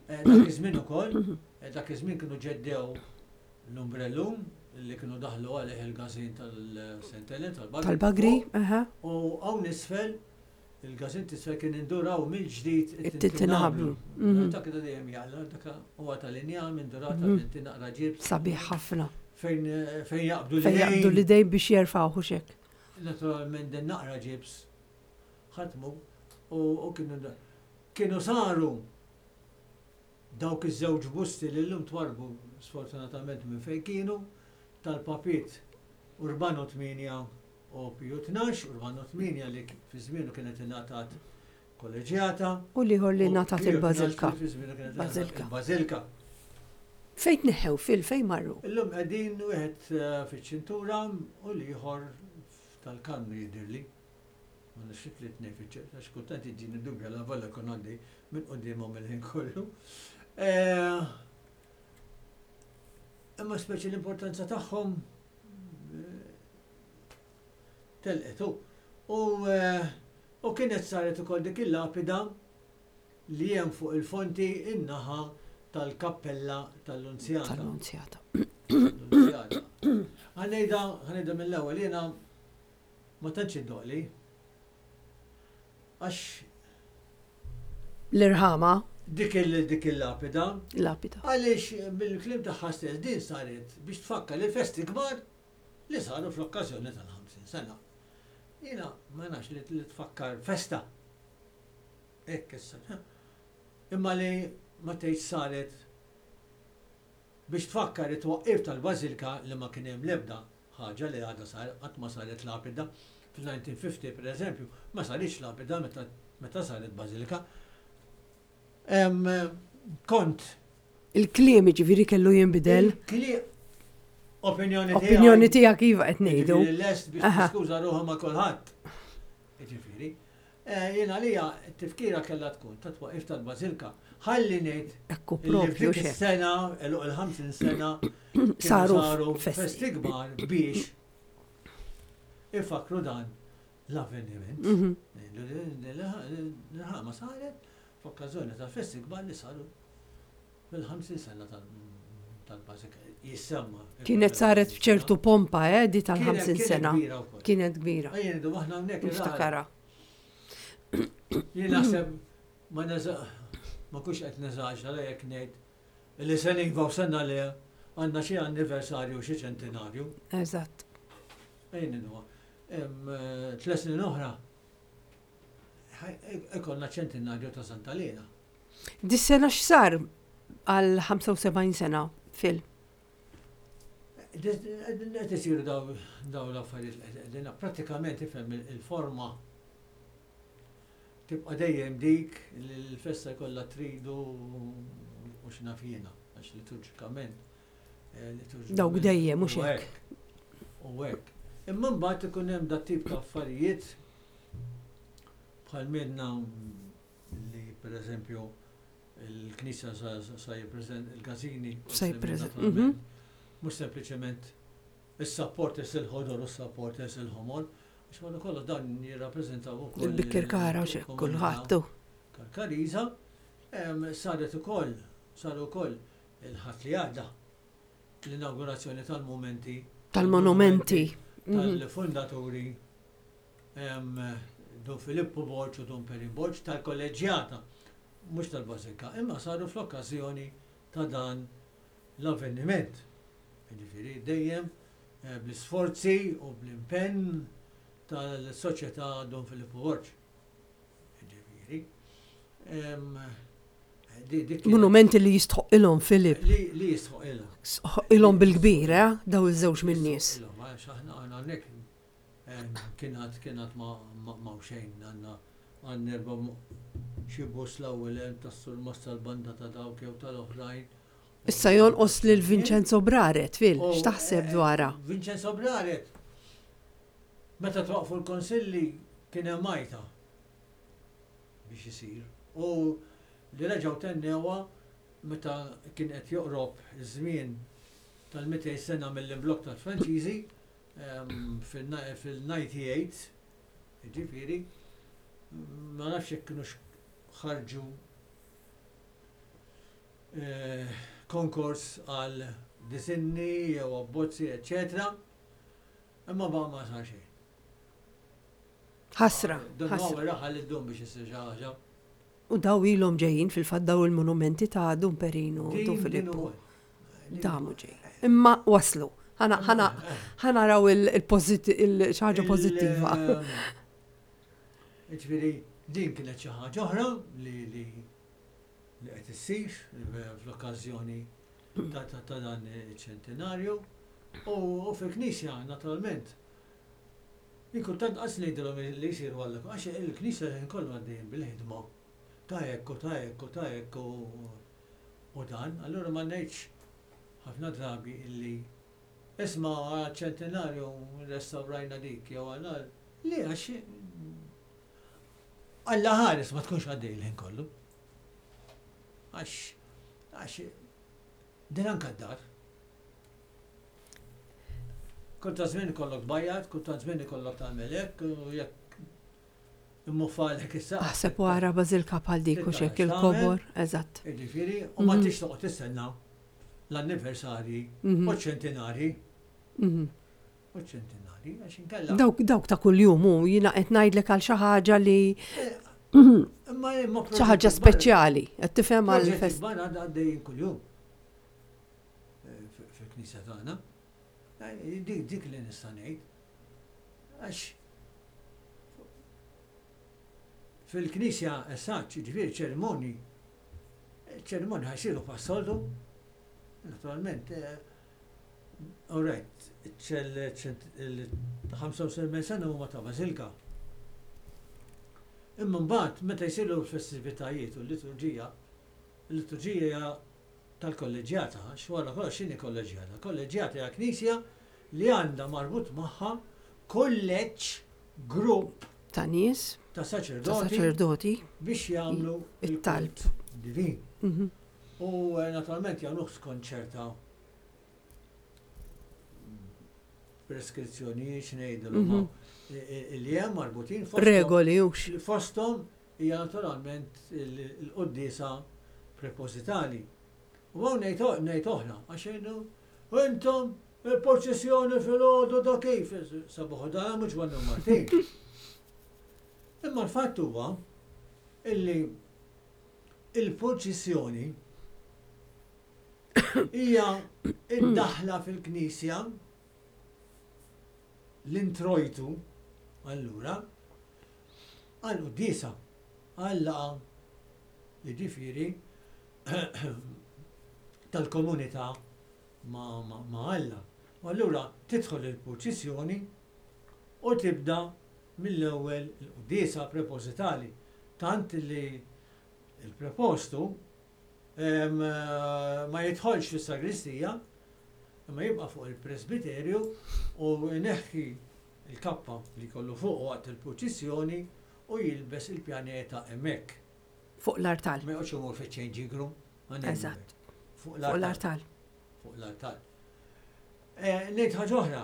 Eh, Dak iż-żmien ukoll, eh, dak iż-żmien kienu ġeddew l-umbrellum li kienu daħlu għalih il-każin tal-Saint Helen tal-Bagri. Tal-Bagri, aha. U hawn isfel, il-każin t'isfel kien induraw mill-ġdid It-tintinablu. Mhm. Dak da dejjem jaqla, dak huwa tal-injam indurata Mhm. tinti naqra ġibs. Sabiħ ħafna. Fejn fejn jaqbdu Fejn jaqbdu l-idejn biex jerfgħu xek. Naturalment din naqra ġibs ħatmu u u kienu kienu saru dawk iż-żewġ busti li llum twarbu sfortunatament minn fejn kienu tal-papit Urbano tmienja u Piju tnax, Urbano tmienja li fi żmienu kienet ingħatat kolleġjata. U l-ieħor li u ngħatat Piju il-Bażilka. tnax li fi żmienu kienet ingħatat Bażilka. il-Bażilka. Fejn tneħħew fil fejn marru? Illum qegħdin wieħed eh, fiċ-ċintura u l-ieħor tal-Karmnu jidhirli. Ma nafx li tnej fiċ għax kultant jiġini dubja la valla kun għandi minn quddiemhom il-ħin kollu. Eh, Imma speċi l-importanza tagħhom eh, telqet u. U eh, u kienet saret ukoll dik il-lapida li hemm fuq il-fonti in-naħa tal-kappella tal-Lunzjata. Tal-Lunzjata. Tal-Lunzjata. Ħa ngħidha, ħa ngħidha mill-ewwel jiena ma tantx iddoqli. Għax L-irħama, dik il dik il-lapida, lapida. għaliex bil-kliem tagħha stess din saret biex tfakkar il-festi kbar li saru fl-okkażjoni tal-ħamsin sena. Jiena ma nafx li li tfakkar festa. Hekk issa. Imma li ma tgħidx saret biex tfakkar it-twaqqif tal-Bażilka li ma kien hemm l-ebda ħaġa li għadha sar qatt ma saret lapida. Fil-elf disa' mija u ħamsin per eżempju, ma saritx lapida meta meta saret Bażilika. Em, Kont Il-kliem ġifieri kellu jinbidel. Il-kliem opinjoni tiegħi. Opinjoni tiegħek iva qed ngħidu. Jiġifieri lest biex Aha. tiskuża ruħha ma' kulħadd. Jiġifieri, eh, jien għalija t-tifkira kellha tkun ta' twaqif tal-Bażilka. Ħalli ngħid Ekku illi propju f'dik xek. is-sena, għeluq il-ħamsin sena, kienu Saru saru festi. festi kbar biex ifakru dan l-avveniment. Mhm. L-ħama saret f'okkażjoni ta' festi kbar li saru fil-ħamsin sena tal- tal-Bażilka. Jissemma. Kienet saret b'ċertu pompa, eh, di tal-ħamsin Kienet sena. kbira wkoll. Kienet kbira. Ejja ngħidu aħna hawnhekk il-raħal Niftakara. Jien naħseb ma ma kux qed neżaġera jekk ngħid li sena iva u sena le għandna xi anniversarju, xi ċentinarju. Eżatt. Ejn huwa. Tliet snin oħra ikollna ċentinarju ta' Santa Lena. Dis-sena x'sar għal ħamsa u sebgħin sena, Phil? Qed isiru daw l-affarijiet qegħdin pratikament, ifhem, il-forma tibqa' dejjem dik li l-festa jkollha tridu u x'naf jiena, għax liturġikament. eh, Dawk dejjem, mhux hekk. U hekk. Imma mbagħad ikun hemm dat tip ta' affarijiet bħal minna li, pereżempju, il-Knisja sa jippreżent il-każini. Sa jippreżent, mhm. Mhux sempliċement is-supporters il-ħodor u s-supporters il-ħomor, għax wara kollox dan jirrappreżentaw ukoll Il-Birkirkara u xek, kulħadd. Karkariża. Saret ukoll, saru wkoll il-Ħadd li għadda l-inaugurazzjoni tal-momenti Tal-monumenti. tal-fondaturi Dun Filippo Borg u Dun Perin Borg tal-kolleġjata, mhux tal-Bażilika, imma saru fl-okkażjoni ta' dan l-avveniment. Ġifieri dejjem eh, bl-isforzi u bl-impenn tal-Soċjetà Dun Filippo Borg. Ġifieri. Monumenti li jistħoq ilhom, Filip. Li jistħoq ilhom. Ilhom bil-kbir, eh? Daw iż-żewġ min-nies. Għax aħna għandek kienet kienet ma ma xejn, għandna għandna erba' xi bus l-ewwel hemm tas-surmast tal-banda ta' dawk jew tal-oħrajn. Issa jonqos lil Vincenzo Braret, Phil, x'taħseb dwarha? Vincenzo Braret. Meta twaqfu l-konsilli kien hemm majta biex isir. U li reġgħu tennewha meta kien qed joqrob iż-żmien tal-mitejn sena mill-imblokk tal-Franċiżi fil-disgħa u disgħin, ġifieri, ma nafx jekk kienux ħarġu eh, konkors għal disinni jew abbozzi, eccetera. Imma ba ma sar xejn. Ħasra. Dun huwa raħal id-dum biex isir xi ħaġa. U daw ilhom ġejjin fil-fatt, daw il-monumenti ta' Dun Perinu, Dun Filippo. Damu ġejjin. Imma waslu. Ħa naraw il-ħaġa pożittiva. Ġifieri, din kienet xi ħaġa oħra li li li qed issir fl-okkażjoni ta' dan iċ-ċentinarju. U fil-Knisja, naturalment, kultant qas ngħidilhom li jsiru għalla, għax il-Knisja kollu għaddejjin bil-ħidma ta' hekk u ta' hekk u ta' hekk u dan, allura ma ngħidx ħafna drabi illi isma', ċentinarju restawrajna dik jew għalla li, għax Alla ħares ma tkunx għaddej l-ħin kollu. Għax, għax, din anka d-dar. Kultant żmien ikollok bajjat, kultant żmien ikollok tagħmel hekk, u jekk immufalek issa. Aħseb wara bażilka bħal dik u xek il-kobor, eżatt. Ġifieri, u ma tix toqgħod tistenna l-anniversarji u ċentinarji. U ċentinarji, għax inkella. Dawk dawk ta' kuljum u jiena qed ngħidlek għal xi ħaġa li Imma imma xi ħaġa speċjali, qed tifhem, għal fest. Barra għaddejjin kuljum eh, fil-knisja tagħna. Eh, Dik dik li nista' ngħid. Għax fil-knisja esatt, ġifieri ċerimoni, ċerimoni ħa jsiru bħas-soltu, naturalment, eh, all right, il-ħamsa u sebgħin sena huma ta' Bażilka. Imma mbagħad meta jsiru l-festivitajiet u l-liturġija, l-liturġija hija tal-kolleġjata, għax wara kollox x'inhi kolleġjata? Kolleġjata hija knisja li għandha marbut magħha kulleġġ, grupp ta' nies, ta' ta' saċerdoti saċerdoti biex jagħmlu it-talb. il-kult divin. Mhm. U eh, naturalment jagħmluh skont ċerta preskrizzjonijiet, x'ngħidilhom, Mhm. li hemm marbutin fosthom- Regoli hux. li fosthom hija naturalment il-quddiesa prepositali. U hawn ngħid ngħid oħra, għax jgħidu intom il-proċessjoni fil-għodu da kif sabuħu da mhux Ġwanni Martin. Imma l-fatt huwa illi il-purċissjoni hija id-daħla fil-Knisja, l-introjtu, allura, għal-quddiesa, għal-laqgħa, jiġifieri tal-komunità ma', ma, ma' Alla. U allura tidħol il-purċissjoni u tibda mill-ewwel il-quddiesa prepositali. Tant li il-prepostu em, ma jidħolx fis-sagristija, imma jibqa' fuq il-presbiterju u jneħħi il-kappa li kollu fuq waqt il-purċissjoni u jilbes il-pjaneta hemmhekk. Fuq l-artal. Ma joqgħodx imur fiċ-changing room. Ma ngħidu Eżatt. hekk. Fuq Fuq l-artal. l-artal. Fuq l-artal. Eh, Ngħid ħaġa oħra.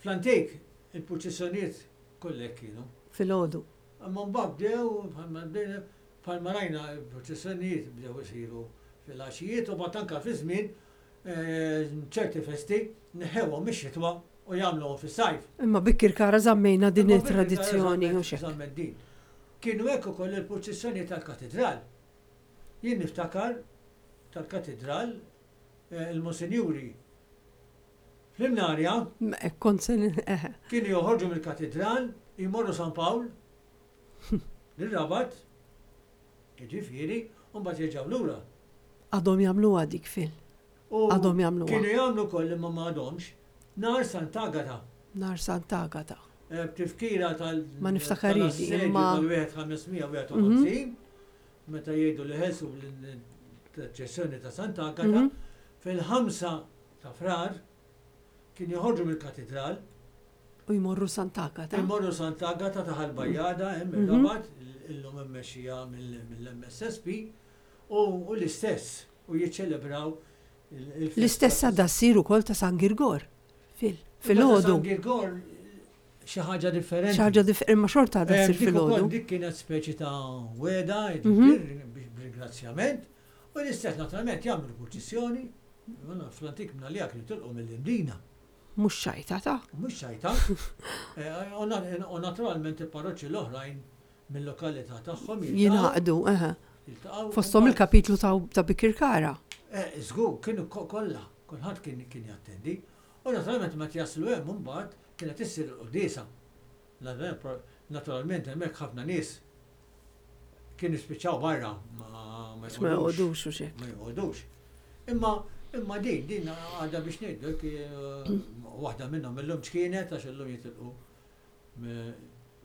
Fl-antik il-purċissjonijiet kollek kienu. Filgħodu. Imma mbagħad bdew bħalma bdejna bħalma rajna il-purċissjonijiet bdew isiru fil-għaxijiet u mbagħad anke fi żmien eh, ċerti festi neħewhom mix-xitwa u jagħmluhom fis-sajf. Imma Bikirkara żammejna din Imma it-tradizzjoni Bikirkara u xek. żammet din. Kienu hekk ukoll il-purċissjoni tal-katedral. Jien niftakar tal-katedral eh, il-monsinjuri fl-Imnarja Kont se eħe. kienu joħorġu mill-katedral, jmorru San Pawl, nir-Rabat, jiġifieri, u mbagħad jerġgħu lura. Għadhom jagħmluha dik fil. U Għadhom jagħmluha. Kienu jagħmlu koll imma ma għadhomx. Nar Sant'Agata. Nar Sant'Agata. Eh, B'tifkira tal- Ma niftakarix di, tal-assedju imma- tal-wieħed ħames mija wieħed u ħamsin, meta jgħidu li ħelsu l-ċessjoni ta' Sant'Agata, Mhm. fil-ħamsa ta' Frar kien joħorġu mill-katedral, U jmorru Sant'Agata. imorru Sant'Agata ta' Ħal-Bajjada, hemm Mhm. ir-Rabat, illum immexxija mill-M S S P, u u l-istess, u jiċċelebraw il- il-festa L-istess ta' għadha ssir ukoll ta' San Girgor. Fil. Imma ta' Filgħodu. San Girgor xi ħaġa differenti. Xi ħaġa dif- imma xorta għadha Eh, ssir Dik ukoll filgħodu. dik kienet speċi ta' weda, Mhm. jiġifieri, b'ringrazzjament, u l-istess naturalment jagħmlu purċissjoni, fl-antik minna li kienu tilqu mill-Imdina. Mhux xajta ta' Mhux xajta. Eh, U na- u naturalment il-parroċċi l-oħrajn mill-lokalità tagħhom jiltaqgħu- jingħaqdu, eħe. jiltaqgħu Fosthom u il-kapitlu ta' ta' Bikirkara. Eh, Żgur, kienu ko- kollha, kulħadd kien kien jattendi. U naturalment meta jaslu hemm imbagħad kienet issir il-quddiesa. Naturalment hemmhekk ħafna nies kienu spiċċaw barra ma ma Ma jqogħdux. jqogħdux u xejn. Ma jqogħdux. Imma imma din din għadha biex ngħidu eh, waħda minnhom illum x'kienet, għax illum jitilqu mi-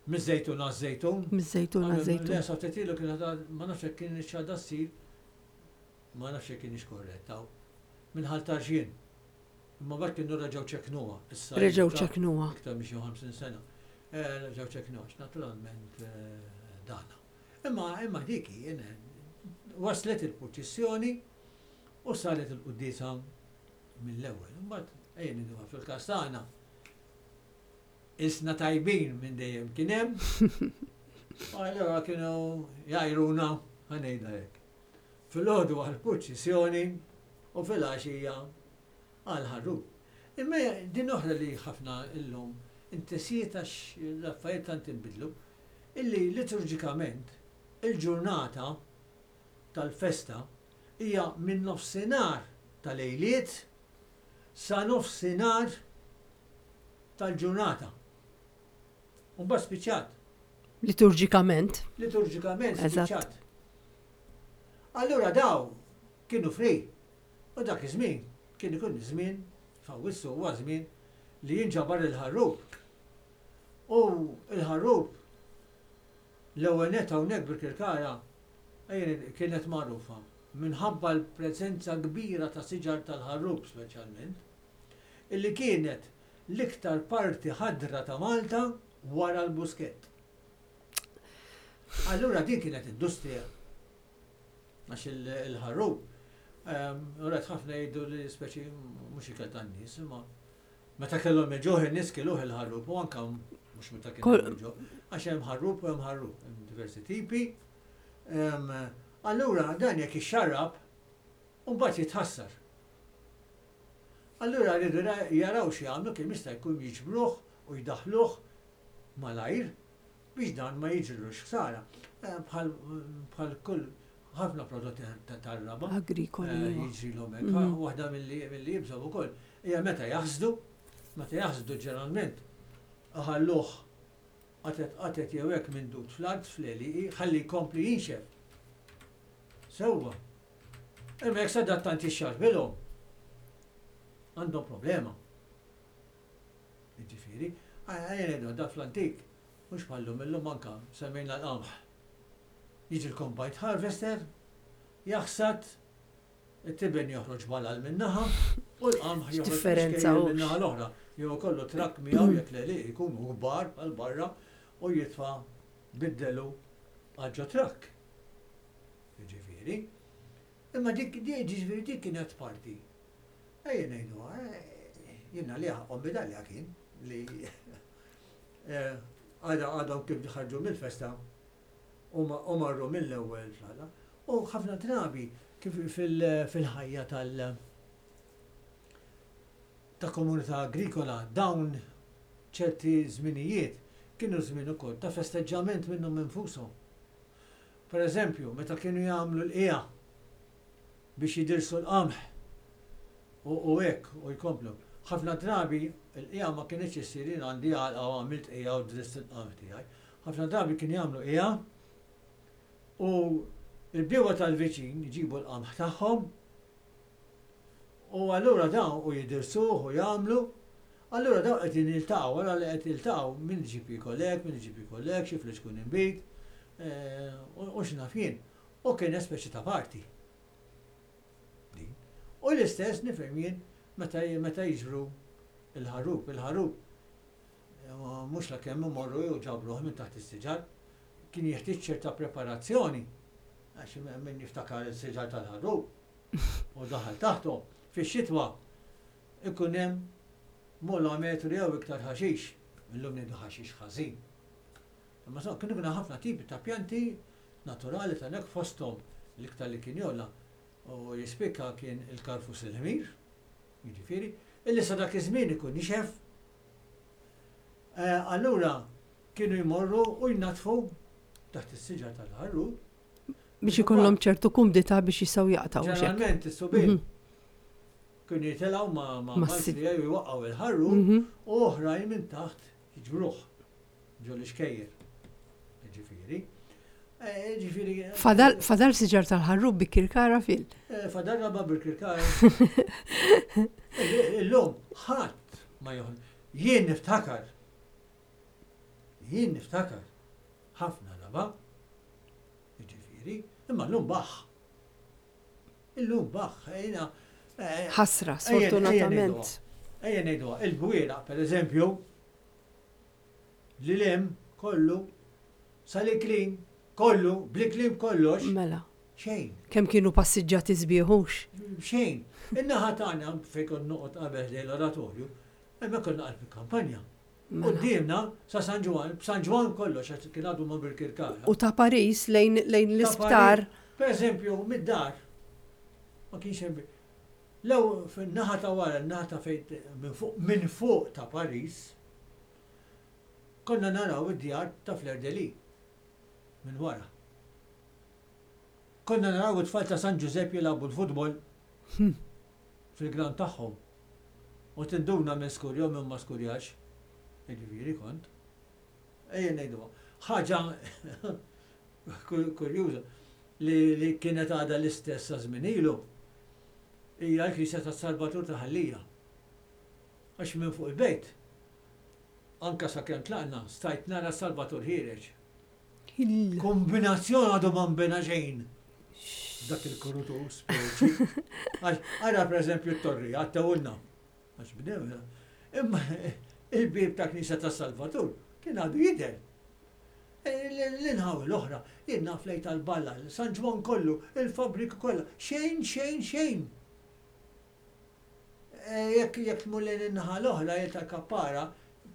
miż-Żejtun għaż-Żejtun. Miż-Żejtun għaż-Żejtun. Le, sa ftit ilu kienet għad- ma nafx jekk kien għadha ssir, ma nafx jekk kienx korretta. Minn Ħal Tarxien. Imma mbagħad kienu reġgħu ċeknuha. Issa Reġgħu iktar- ċeknuha. Iktar minn xi ħamsin sena. Eh, Reġgħu ċeknuha, għax naturalment eh, dana. Imma imma dik jien waslet il-purċissjoni u saret il-quddiesa mill-ewwel. Imbagħad ejja ngħiduha fil-każ tagħna. Isna tajbin minn dejjem kien hemm. U allura kienu jgħajruna, ħa ngħidha hekk. Filgħodu għall-purċissjoni u filgħaxija għal-ħarrub. Imma din oħra li ħafna illum intesiet għax l-affarijiet tant inbidlu, illi liturġikament il-ġurnata tal-festa hija minn nofsinhar tal-lejliet sa nofsinhar tal-ġurnata. U mbagħad spiċċat. Liturġikament. Liturġikament Eżatt. spiċċat. Allura daw kienu free. U dak iż-żmien kien ikun iż-żmien, f'Awwissu huwa żmien li jinġabar il-ħarrub. U il-ħarrub l-ewwel net hawnhekk Birkirkara ejja, kienet magħrufa minħabba l-preżenza kbira ta' siġar tal-ħarrub speċjalment, illi kienet l-iktar parti ħadra ta' Malta wara l-Buskett. Allura din kienet industrija. Għax il- il-ħarrub, ehm, rajt ħafna jgħidu li speċi mhux ikel tan-nies, imma meta kellhom il-ġuħ in-nies kiluh il-ħarrub u anka mhux meta Kol- kellhom il-ġuħ. Għax hemm ħarrub u hemm ħarrub, hemm diversi tipi. Ehm, Allura dan jekk ixxarrab, u mbagħad jitħassar. Allura rridu ra- jaraw xi jagħmlu kemm jista' jkun jiġbruh u jdaħluh malajr Biex dan ma jiġrilux ħsara. Eh, bħal bħal kull ħafna prodotti ta- tar-raba. Agrikoli. Eh, huwa. Jiġrilhom hekk. Mhm. Waħda milli milli jibżgħu ukoll hija meta jaħsdu, meta jaħsdu ġeneralment iħalluh qatet qatet jew hekk mindud fl-art fl-għelieqi ħalli jkompli jinxef. Sewwa. Imma jekk sadattant jixxarbilhom għandhom problema. Jiġifieri, ejja ngħidu da fl-antik, mhux bħallum illum anka semmejna l-qamħ. Jiġi l-combined harvester, jaħsad, it-tiben joħroġ balal min-naħa u l-qamħ joħroġ X'differenza xkejjer hux. min-naħa l-oħra. Jew kollu trakk miegħu jekk l jkunu kbar għal barra u jitfa' biddelu għal ġo trakk. Jiġifieri. Imma dik dik ġifieri dik kienet parti. Ejja ngħidu, eh, jiena li ħaqhom medalja kien li eh, għada għadhom kif ħarġu mill-festa u ma- u marru mill-ewwel fl U ħafna drabi kif fil- fil-ħajja tal- ta' komunità agrikola dawn ċerti żminijiet kienu żmien ukoll ta' festeġġament minnhom infushom. Per eżempju, meta kienu jagħmlu l-qija biex jidirsu l-qamħ u u hekk u jkomplu. Ħafna drabi l-qija ma kienx issir jien għandi għalqa u għamilt qija u drist il-qamħ tiegħi. Ħafna drabi kienu jagħmlu qija u il-bdiewa tal-viċin jġibu l-qamħ tagħhom u allura dawn u jidirsuh u jagħmlu. Allura dawn qed jiltaqgħu wara li qed jiltaqgħu min iġib jiekol hekk, min iġib jiekol hekk, xi flixkun inbid, eh, u u x'naf jien. U kien speċi ta' party. Din. U l-istess nifhem jien meta meta jiġbru il-ħarrub, il-ħarrub eh, mhux la kemm imorru jew ġabruh minn taħt is-siġar, kien jeħtieġ ċerta preparazzjoni għax min jiftakar is-siġar tal-ħarrub u daħal taħthom. Fix-xitwa ikun hemm mola metru jew iktar ħaxix. Illum ngħidu ħaxix ħażin. Imma so, kienu kienu ħafna tipi ta' pjanti naturali ta' nek fosthom l-iktar li kien jola u jispikka kien il-karfus il-ħmir, jiġifieri, illi sa dak iż-żmien ikun nixef. Eh, Allura kienu jmorru u jnatfu taħt is-siġar tal-ħarrub. Biex ikollhom ċertu kumdità biex jistgħu jaqtgħu xek. Ġeneralment is-subien Mhm. kienu jitilgħu ma' ma' Ma' s- mal-frija u jwaqqgħu il-ħarrub Mhm. u oħrajn minn taħt jiġbruh ġo l-ixkejjer. Ġifieri. Eh, Ġifieri. Fadal fadal siġar tal-ħarrub Birkirkara fil. eh, Fadal raba Birkirkara. Illum ħadd ma joħol. Jien niftakar. Jien niftakar. Ħafna raba. Ġifieri, imma llum baħ. Illum baħ. Ejna. eh, Ħasra, ejja- ejja sfortunatament. Ejja ngħiduha, il-bwiera, per eżempju, li lem kollu, sal-Iklin, kollu, bl-Iklin kollox, Mela. xejn, Kemm kienu passiġġati sbieħux. xejn. In-naħa tagħna fejn kont noqgħod qabel ħdejn l-oratorju, hemmhekk konna qalb il-kampanja. Mela. Quddiemna sa San Ġwann, b'San Ġwann kollox għax kien għadu ma' Birkirkara. U ta' Paris lejn lejn l-isptar. Per eżempju, mid-dar, ma kienx hemm. Lew fin-naħa ta' wara, n-naħa ta' fejn minn fuq minn fuq ta' Paris, konna naraw id-djar ta' Fleur de Lis minn wara. Konna naraw it-tfal ta' San Giuseppe jilagħbu l-futbol fil-ground tagħhom. U tinduna minn skurja u minn ma skurjax. Jiġifieri kont. Ejja ngħidu. Ħaġa kurjuża li, li kienet għadha l-istess sa żmien ilu hija l-Knisja ta' Salvatur ta' Ħal Lija. Għax minn fuq il-bejt, anka sa kemm tlaqna, stajt nara Salvatur ħiereġ. Il- Kombinazzjoni għadu ma nbena xejn. Dak il-kurutu speċi. Għax, ara per eżempju t-torri, għattewulna. Għax bdew, imma il-bib ta' Knisja ta' Salvatur kien għadu jidher. L-inħawi l-oħra, jien naf lejn tal-balla, San Ġwann kollu, il-fabrika kollha, xejn, xejn, xejn. Eh, Jekk jekk tmur lejn in-naħa l-oħra jien tal-kappara,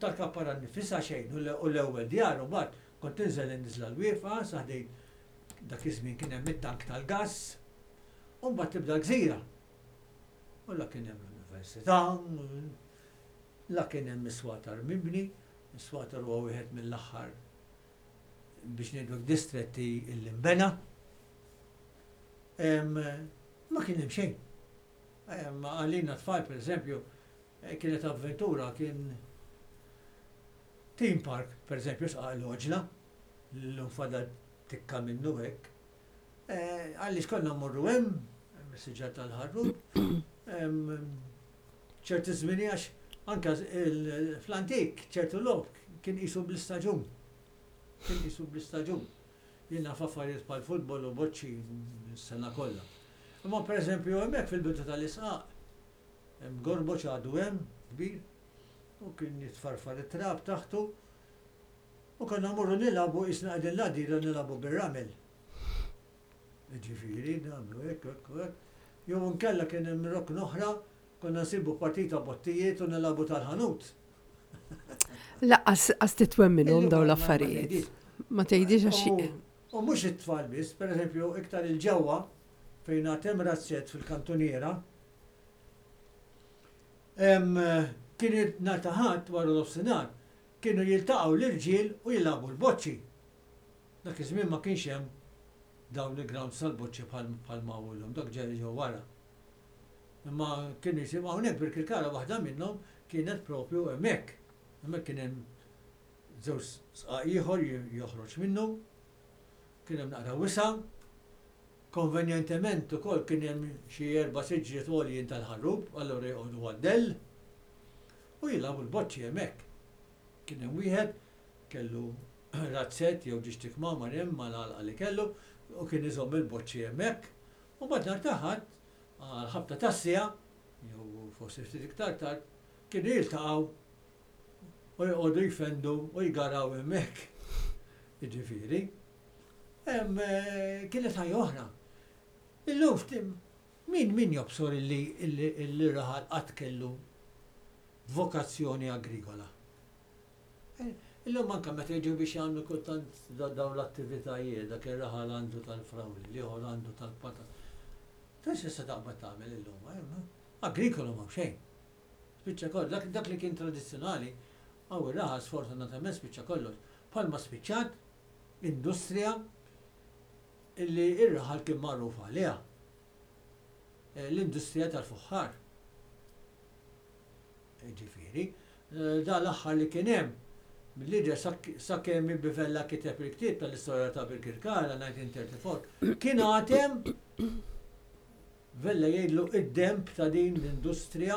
tal-kappara nifisha xejn u l- u l-ewwel djar u mbagħad kont tinżel in-niżla l-wieqfa sa ħdejn dak iż-żmien kien hemm it-tank tal-gass u mbagħad tibda l-gżira. U la kien hemm l-università, la kien hemm is-swatar mibni, is-swatar huwa wieħed mill-aħħar biex ngħidu distretti l-imbena. Ma kien hemm xejn. Għalina tfal, per eżempju, eh, kienet avventura, kien theme park, per eżempju, Sqaq l-Għoġla, l-lum fadal tikka minnu hekk. Eh, għaliex konna mmorru hemm, hemm tal-ħarrub, ċerti żmini għax anka fl-antik ċertu logħob kien qisu bl-istaġun. Kien qisu bl-istaġun. Jien naf affarijiet bħal futbol u boċċi s-sena kollha. Imma pereżempju hemmhekk fil-bidu tal-isqaq, hemm gorboċ għadu hemm kbir u kien jitfarfar it-trab taħtu u konna mmorru nilagħbu qisna qegħdin l-għadira nilagħbu bir-ramel. Ġifieri, nagħmlu hekk, hekk, hekk. Jew inkella kien hemm rokn oħra, konna nsibu partita bottijiet u nilagħbu tal-ħanut. Lanqas qas titwemminhom dawn l-affarijiet. Ma tgħidix għax. U mhux it-tfal biss, pereżempju, iktar il-ġewwa fejn hemm razzett fil-kantuniera. Kien nhar ta' Ħadd wara nofsinhar kienu jiltaqgħu l-irġiel u jilagħbu l-boċċi. Dak iż-żmien ma kienx hemm dawn il-grounds tal-boċċi bħal ma llum, dak ġej ġew wara. Imma kienu jisimu hawnhekk Birkirkara waħda minnhom kienet propju hemmhekk. Hemmhekk kien hemm żewġ sqaq ieħor joħroġ minnu, kien hemm naqra wisa', konvenjentement ukoll kien hemm xi erba' siġriet għoljin tal-ħarrub, allura joqogħdu għad-dell u jilagħbu l-boċċi hemmhekk. Kien hemm wieħed kellu razzett jew ġiex kmamar hemm mal-għalqa li kellu u kien iżomm il-boċċi hemmhekk. U mbagħad nhar ta' Ħadd għal-ħabta tas-siegħa jew forsi ftit iktar tard kienu jiltaqgħu u joqogħdu jfendu u jgaraw hemmhekk. Jiġifieri. Kienet ħajja oħra. Illum min min jobsor illi illi raħal qatt kellu vokazzjoni agrikola. Illum anka meta jiġu biex jagħmlu kultant dawn l-attivitajiet, dak ir-raħal għandu tal-frawli, l-ieħor għandu tal-patata. Tix issa taqbad tagħmel illum, agrikola ma xejn. Spiċċa kollox, dak li kien tradizzjonali, hawn ir-raħal sfortunatament spiċċa kollox. Bħalma spiċċat industrija illi ir-raħal kien magħruf għaliha. L-industrija tal-fuħħar. Ġifieri, da l-aħħar li kien hemm mill-lider sakemm Bivella kiteb il-ktieb tal-istorja ta' Birkirkara elf disa' mija u tletta u erbgħin, kien għad hemm Vella jgħidlu id-demb ta' din l-industrija,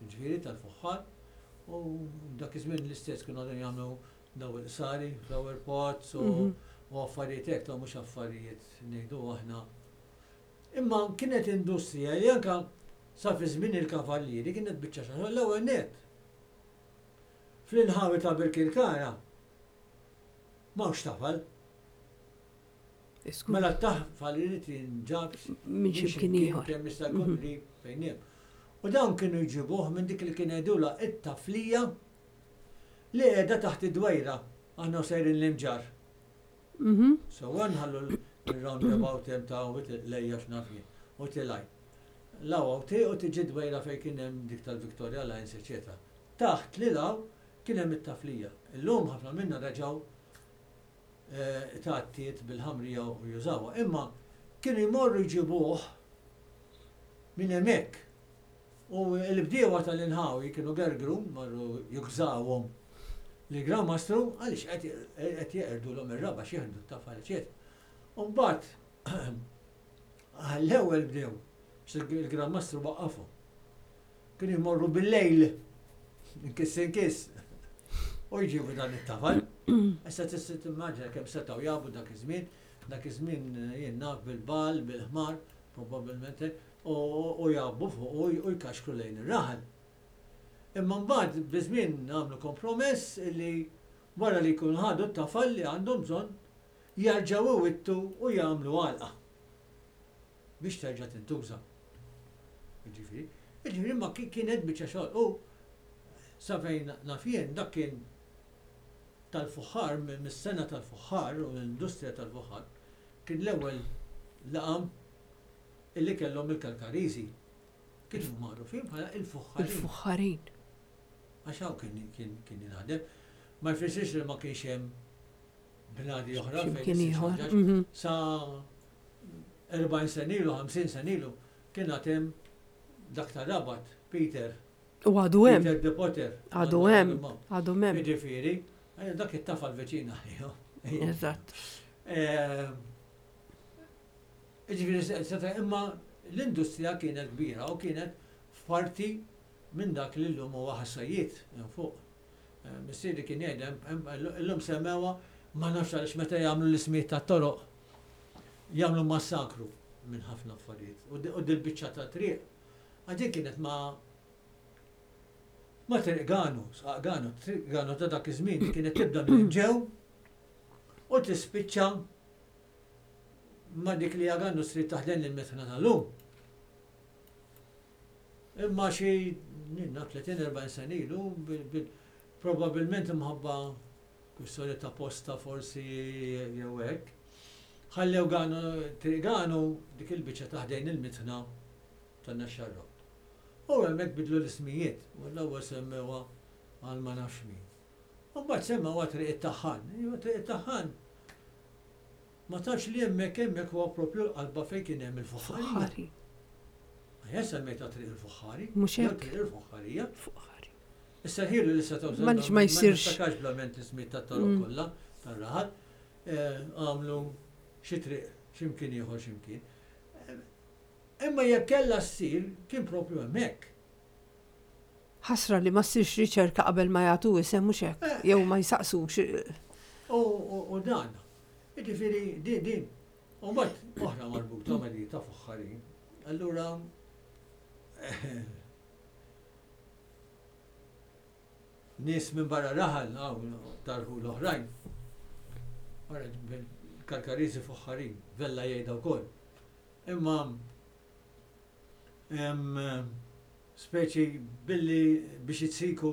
ġifieri tal-fuħħar, u dak iż-żmien l-istess kienu għadhom jagħmlu daw il-qsari, flower pots u mhm. affarijiet hekk, ta' mhux affarijiet ngħidu aħna. Imma kienet industrija li anka sa fi żmien il-kavallieri kienet biċċa xogħol l-ewwel net. Fl-inħawi ta' Birkirkara m'hawnx tafal. Mela t-tafal irid jinġab minn xi kien ieħor. Kemm jista' jkun mhm. qrib fejn hemm. U dawn kienu jġibuh minn dik li kien jgħidulha it-taflija li qiegħda taħt id-dwejra aħna sejrin l-Imġarr. Mhm. So nħallu l-roundabout hemm ta' lejja x'naf jien u tilaj. Law u tiġi dwejra fejn kien hemm dik tal-Victoria Lines, eċetera. Taħt li law kien hemm it-taflija. Illum ħafna minna reġgħu eh, tgħattiet bil-ħamrija u jużawha. Imma kienu jmorru jġibuh minn hemmhekk. U l-bdiewa tal-inħawi kienu gergru, marru jukżawhom li Gran Mastru għaliex qed jeqirdu ir-raba' xieħdu t-tafal, eċetera. U mbagħad għall-ewwel bdew, il-Gran Mastru waqqafhom. Kienu jmorru bil-lejl, inkiss inkiss, u jġibu dan it-tafal. Issa tista' timmaġina kemm setgħu jabu dak iż-żmien, dak iż-żmien jien naf bil-bal, bil-ħmar, probabbilment, u jabu fuq u jkaxkru lejn ir-raħal. Imma mbagħad biż-żmien nagħmlu kompromess li wara li jkunu ħadu t-tafal li għandhom bżonn jarġgħu iwittu u jagħmlu għalqa biex terġa' tintuża. Ġifieri, ġifieri ma kienet biċċa xogħol. U sa fejn naf jien dak kien tal-fuħħar, mis-sena tal-fuħħar u l-industrija tal-fuħħar, kien l-ewwel laqam illi kellhom il-Kalkariżi. Kienu magħrufin bħala il-fuħħarin. ' Il-fuħħarin. Għax hawn kien kien kien jinħadem. Ma jfissirx li ma kienx hemm bnadi oħra fejn X'imkien issir ieħor. ħaġa. Mhm. Sa erbgħin sena ilu, ħamsin sena ilu, kien għad hemm dak ta' Rabat, Peter. U għadu hemm. Peter de Potter. Għadu hemm. Għadu hemm. Jiġifieri, eh, dak it-tafal veċina. Eżatt. Eh, Jiġifieri, seta' imma l-industrija kienet kbira u kienet f'parti minn dak li llum huwa Ħas-Sajjied hemm fuq. Eh, Missieri kien jgħid hemm- hemm- illum semmewha, ma nafx għaliex, meta jagħmlu l-ismijiet tat-toroq jagħmlu massakru minn ħafna affarijiet. U di- U dil-biċċa ta' triq għadin kienet ma ma Triq Ganu, Sqaq Ganu, Triq Ganu ta' dak iż-żmien kienet tibda minn ġew u tispiċċa ma dik li għandu street taħdem il-mitħna tal-lum. Imma xi ninna tletin erbgħin sena ilu, bil- bil- probabilment imħabba kwistjoni ta' posta forsi jew hekk, ħallew Ganu, Triq Ganu, dik il-biċċa taħdejn il-mitħna tan-Naxxar Road. U hemmhekk bidlu l-ismijiet, u l-ewwel semmewha għal ma nafx min. U mbagħad semmewha Triq it-Taħħan. Iva, Triq it-Taħħan. Ma tafx li hemmhekk hemmhekk huwa propju l-qalba fejn kien hemm il-fuħħarija. Fuħħari. Ejja semmejta Triq il-Fuħħari. Mhux Jew hekk. Triq il-Fuħħarija. Fuħħari. Issa ħilu li setgħu Ma nix ma jsirx. Ma niftakarx blament l-ismijiet tat-toroq Mm. kollha tar-raħal. Eh, Għamlu xi triq x'imkien ieħor x'imkien. Eh, Imma jekk kellha ssir kien propju hemmhekk. Ħasra li ma ssirx riċerka qabel ma jagħtu isem, mhux hekk? Eh. Jew ma jsaqsux. U, u, u dan. Jiġifieri din din. U mbagħad oħra marbuta ma' di ta' fuħħari. Allura eh, nies minn barra raħal, hawn tarħu l-oħrajn. Wara Karkariżi fuħħarin, Vella jgħidha wkoll. Imma em, speċi billi biex jitsiku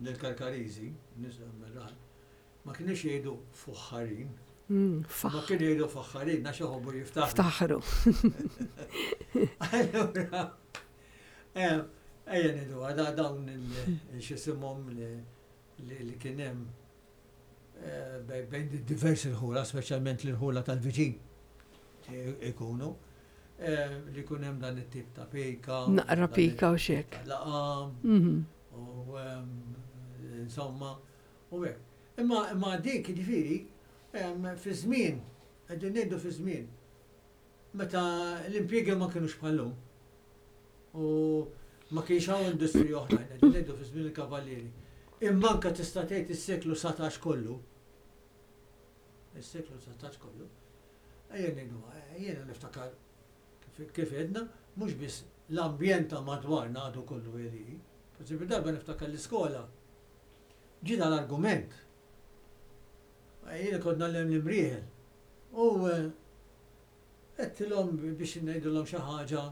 lill-Karkariżi, nies minn raħal, ma kienux jgħidu fuħħarin, Mm, ma Faħ. kienu jgħidu faħħarin, għax iħobbu jiftaħru. Ftaħru. Allura, eh, ejja ngħidu, għada dawn il-xisimhom li li kien hemm eh, bej- bejn diversi rħula, speċjalment l-rħula tal-viċin ikunu, eh, li jkun hemm dan it-tip ta' pika. Naqra dan pika u it-tip xek. ta' Laqam, Mhm. u em, insomma, u hekk. Imma imma dik jiġifieri em, fi żmien, qegħdin ngħidu fi żmien, meta l-impjiegi ma kinux bħallum u ma kienx hawn industriji oħrajn, qegħdin ngħidu fi żmien il-kavallieri. Imma anke tista' tgħid is-seklu satax kollu. Is-seklu satax kollu. Ejja ngħidu, jiena niftakar kif- kif għedna, mhux biss l-ambjent ta' madwarna għadu kollu għeli. Per eżempju, darba niftakar l-iskola. Ġie l-argument. Jiena kont ngħallem l-Imrieħel. U eh, għedtilhom biex ngħidulhom xi ħaġa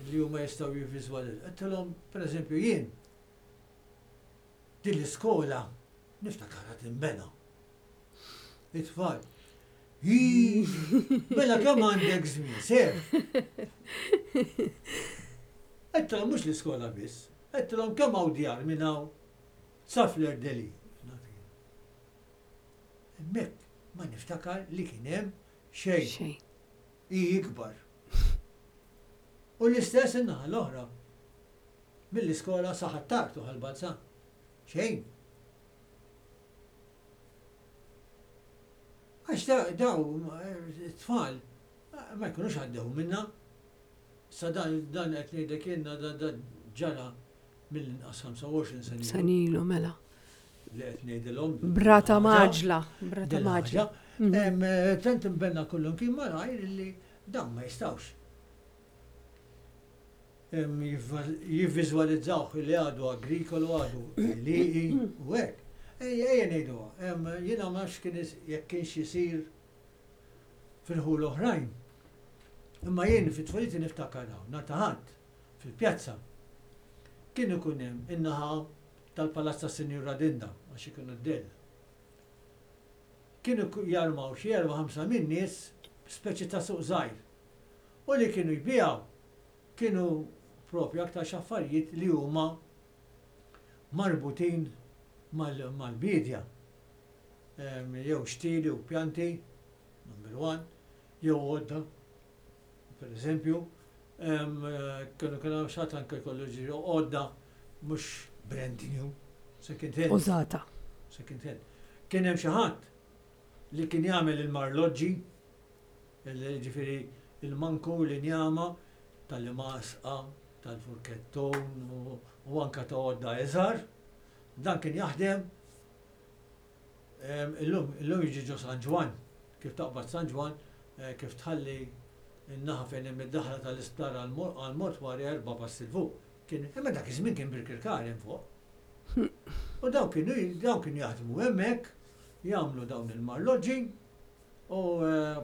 li huma jistgħu jivviżwalizzaw. Għedtilhom, per eżempju, jien din l-iskola niftakarha tinbena. It-tfal. Ii, mela kemm għandek żmien, ser. Għedtilhom mhux l-iskola biss, għedtilhom kemm hawn djar minn hawn sa Fleur-de-Lys. Hemmhekk ma niftakar li kien hemm xejn. Xejn. I ikbar. U l-istess in-naħa l-oħra. Mill-iskola sa Ħ'Attard u Ħal Balzan. Xejn. Għax da- daw eh, tfal eh, ma jkunux għaddew minna. Sa dan dan qed ngħidlek jiena dan dan ġara mill-inqas ħamsa u għoxrin sena ilu Sena ilu mela. li qed ngħidilhom. Brata ħaġa. maġla. Brata Din maġla. ħaġa. Em, eh, Tant imbenna kullum kien malajr li dawn ma jistawx. Em, jivva- Jivviżwalizzawh li għadu agrikolu, għadu liqi u hekk. Ejja, ejja ngħiduha. Em, Jiena ma nafx kien is- jekk kienx isir fil-ħul oħrajn. Imma jien fit-tfuliti niftakar hawn, nhar ta' Ħadd fil-pjazza. Kien ikun hemm in-naħa tal-Palazz tas-Sinjura Dinda għax ikunu d-dell. Kienu ku- jarmaw xi erba' ħamsa minn nies speċi ta' suq żgħir. U li kienu jbijaw kienu propju aktar xaffarijiet li huma marbutin mal- mal-bidja. Jew xtieli u pjanti, number one, jew għodda, per eżempju, kienu kienu xat anke jkollu ġiri għodda mhux brand new, second hand. Użata. Second hand. Kien hemm xi ħadd li kien jagħmel il-marloġġi, ġifieri il-manku, l-injama, tal-imasqa, tal-furkettun u anka ta' għodda iżgħar. Dan kien jaħdem illum, illum jiġi ġo San Ġwann, kif taqbad San Ġwann, kif tħalli n-naħa fejn hemm id-daħla tal-isptar għall-mortwari erba' passi 'l fuq. Kien, imma dak iż-żmien kien Birkirkara hemm fuq. U dawn kienu dawn kienu jaħdmu hemmhekk, jagħmlu dawn il-marloġġi u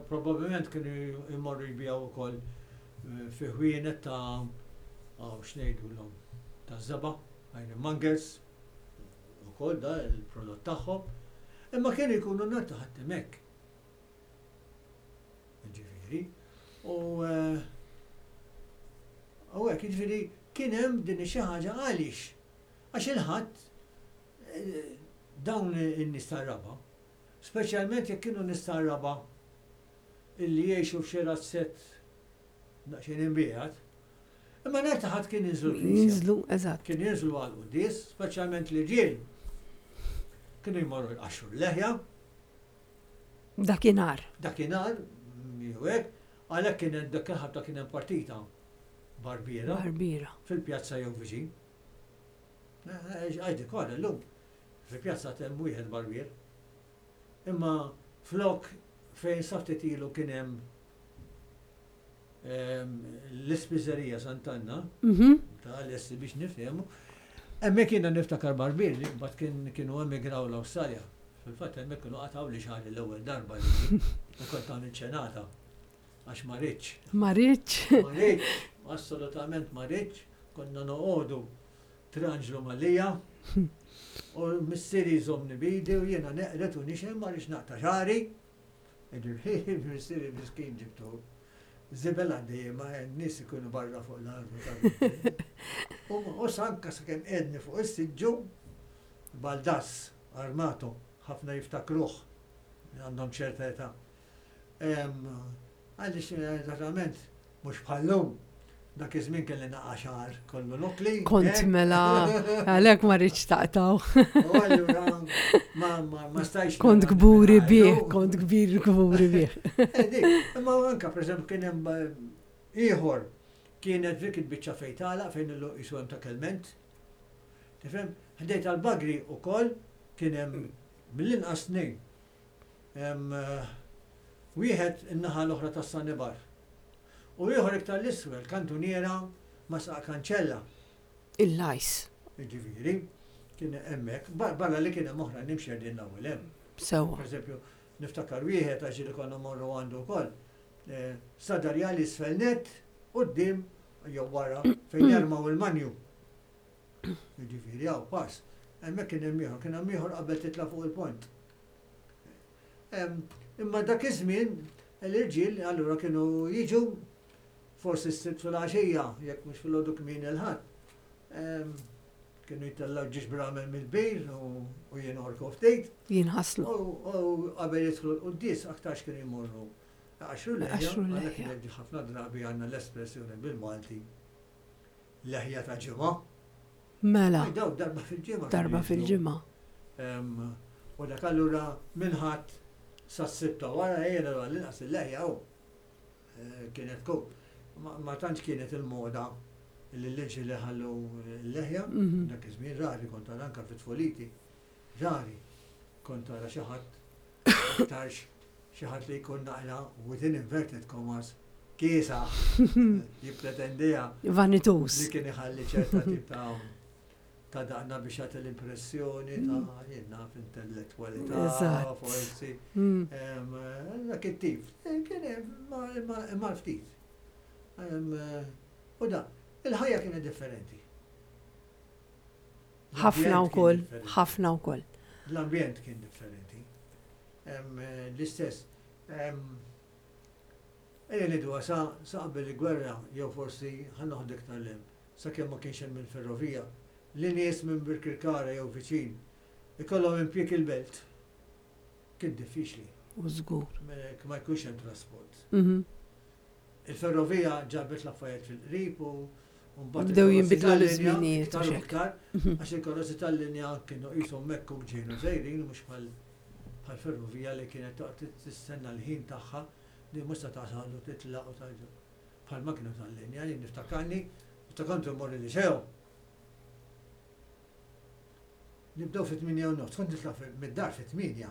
probabbilment kienu jmorru jbiegħu wkoll fi ħwienet ta' x'ngħidulhom ta' żebgħa, ironmongers, ukoll da il-prodott tagħhom. Imma kienu jkunu nhar ta' Ħadd hemmhekk. Ġifieri. U u hekk, jiġifieri kien hemm din xi ħaġa għaliex. Għax il-Ħadd dawn in-nies tar-raba', speċjalment jekk kienu nies tar-raba' illi jgħixu f'xi razzett daqsxejn imbiegħed, imma nhar ta' Ħadd kien jinżlu l-knisja. Jinżlu, eżatt. Kien jinżlu għall-quddies, speċjalment l-irġiel. Kienu jmorru jqaxxru l-leħja. Dakinhar. Dakinhar, jew hekk, għalhekk kien hemm dak il-ħabta kien hemm partita barbiera. Barbiera. Fil-pjazza jew viċin. Għajdi kollha llum. Fil-pjazza hemm wieħed barbier. Imma flok fejn sa ftit ilu kien hemm l-ispiżerija Sant'Anna, Mhm. ta' l-essi biex nifhemu, hemmhekk jiena niftakar barbier li mbagħad kien kienu emigraw l-Awstralja. Fil-fatt hemmhekk kienu qatgħu li xagħri l-ewwel darba li u kont għamil ċenata għax ma ridtx. Ma ridtx. Ma ridtx, assolutament ma ridtx, konna noqogħdu Tranġlu Mallia u missieri jżommni bidi u jiena neqret u nixem ma rridx naqta' xagħri. Ġifieri missieri miskin ġibtu. Żibel għaddej ma n-nies ikunu barra fuq l-armu. U sanka sakemm qegħedni fuq is-siġġu Baldas Armato, ħafna jiftakruh għandhom ċerta età. Għaliex eżattament mhux bħallum dak iż-żmien kelli naqa' xagħar kollu nokli. Kont mela, għalhekk ma rridx taqtaw. U allura ma ma ma stajx. Kont kburi bih, kont kbir kburi bih. Imma anka pereżempju kien hemm ieħor kienet dik il-biċċa fejn tagħlaq fejn illu qisu hemm ta' kelment. Tifhem? Ħdejn tal-bagri ukoll kien hemm mill-inqas tnejn. Wieħed in-naħa l-oħra tas-Sanibar. U ieħor iktar l-isfel, kantuniera ma' saq kanċella. Il-lajs. Ġifieri, kien hemmhekk, barra li kien hemm oħra nimxi din l-ewwel hemm. Sewwa. Per eżempju, niftakar wieħed għax li konna morru għandu wkoll. Sadarjali isfel net, quddiem jew wara fejn jarmaw il-manju. Ġifieri, hawn pass. Hemmhekk kien hemm ieħor, kien hemm ieħor qabel titla' fuq il-pont. Imma dak iż-żmien l-irġiel allura kienu jiġu forsi s-Sibt fil-għaxija, jekk mhux fil-għodu kmieni il-Ħadd. Kienu jitellaw ġiex bramel mill-bir u jinorku ftit. Jinħaslu. U qabel jidħlu l-quddies aktarx kienu jmorru. Għaxru leħja, għalhekk ħafna drabi għandna l-espressjoni bil-Malti. Leħja ta' ġimgħa. Mela. Daw darba fil-ġimgħa. Darba fil-ġimgħa. U dak allura mill-Ħadd sas-Sibt ta' wara jiena l-inqas il-leħja u kienet tkun. Ma tantx kienet il-moda li l-irġiel ħallu l-leħja, dak iż-żmien rari kont tara anke fit-tfuliti. Rari kont tara xi ħadd aktarx xi ħadd li jkun naqra within inverted commas kiesaħ jippretendiha. Vanitus. Li kien iħalli ċerta tip ta' ta' daqna biex jagħti l-impressjoni ta' jien naf intellettwalità, forsi. Dak it-tip. Kien imma ftit. U da, il-ħajja kienet differenti. Ħafna wkoll, ħafna wkoll. L-ambjent kien differenti. L-istess. Ejja ngħidu sa qabel il-gwerra, jew forsi ħa noħdu iktar 'l hemm, sakemm ma kienx hemm il-ferrovija, li nies minn Birkirkara jew viċin ikollhom impjieg il-belt. Kien diffiċli. U żgur. Ma jkunx hemm trasport. Mhm. Il-ferrovija ġabet l-affarijiet fil-qrib u mbagħad Bdew il-karozzi jinbidlu tal-linja l-żminijiet iktar u u xek. iktar, Mhm. għax il-karozzi tal-linja kienu qishom hekk u ġejnu sejrin mhux bħal bħal ferrovija li kienet toqgħod tistenna l-ħin tagħha li mhux se tasal u titlaq u tarġa'. Bħal ma kienu tal-linja, jien niftakarni, meta kont immur il-liceo. Nibdew fit-tmienja u nofs, kont nitlaq fi- mid-dar fit-tmienja.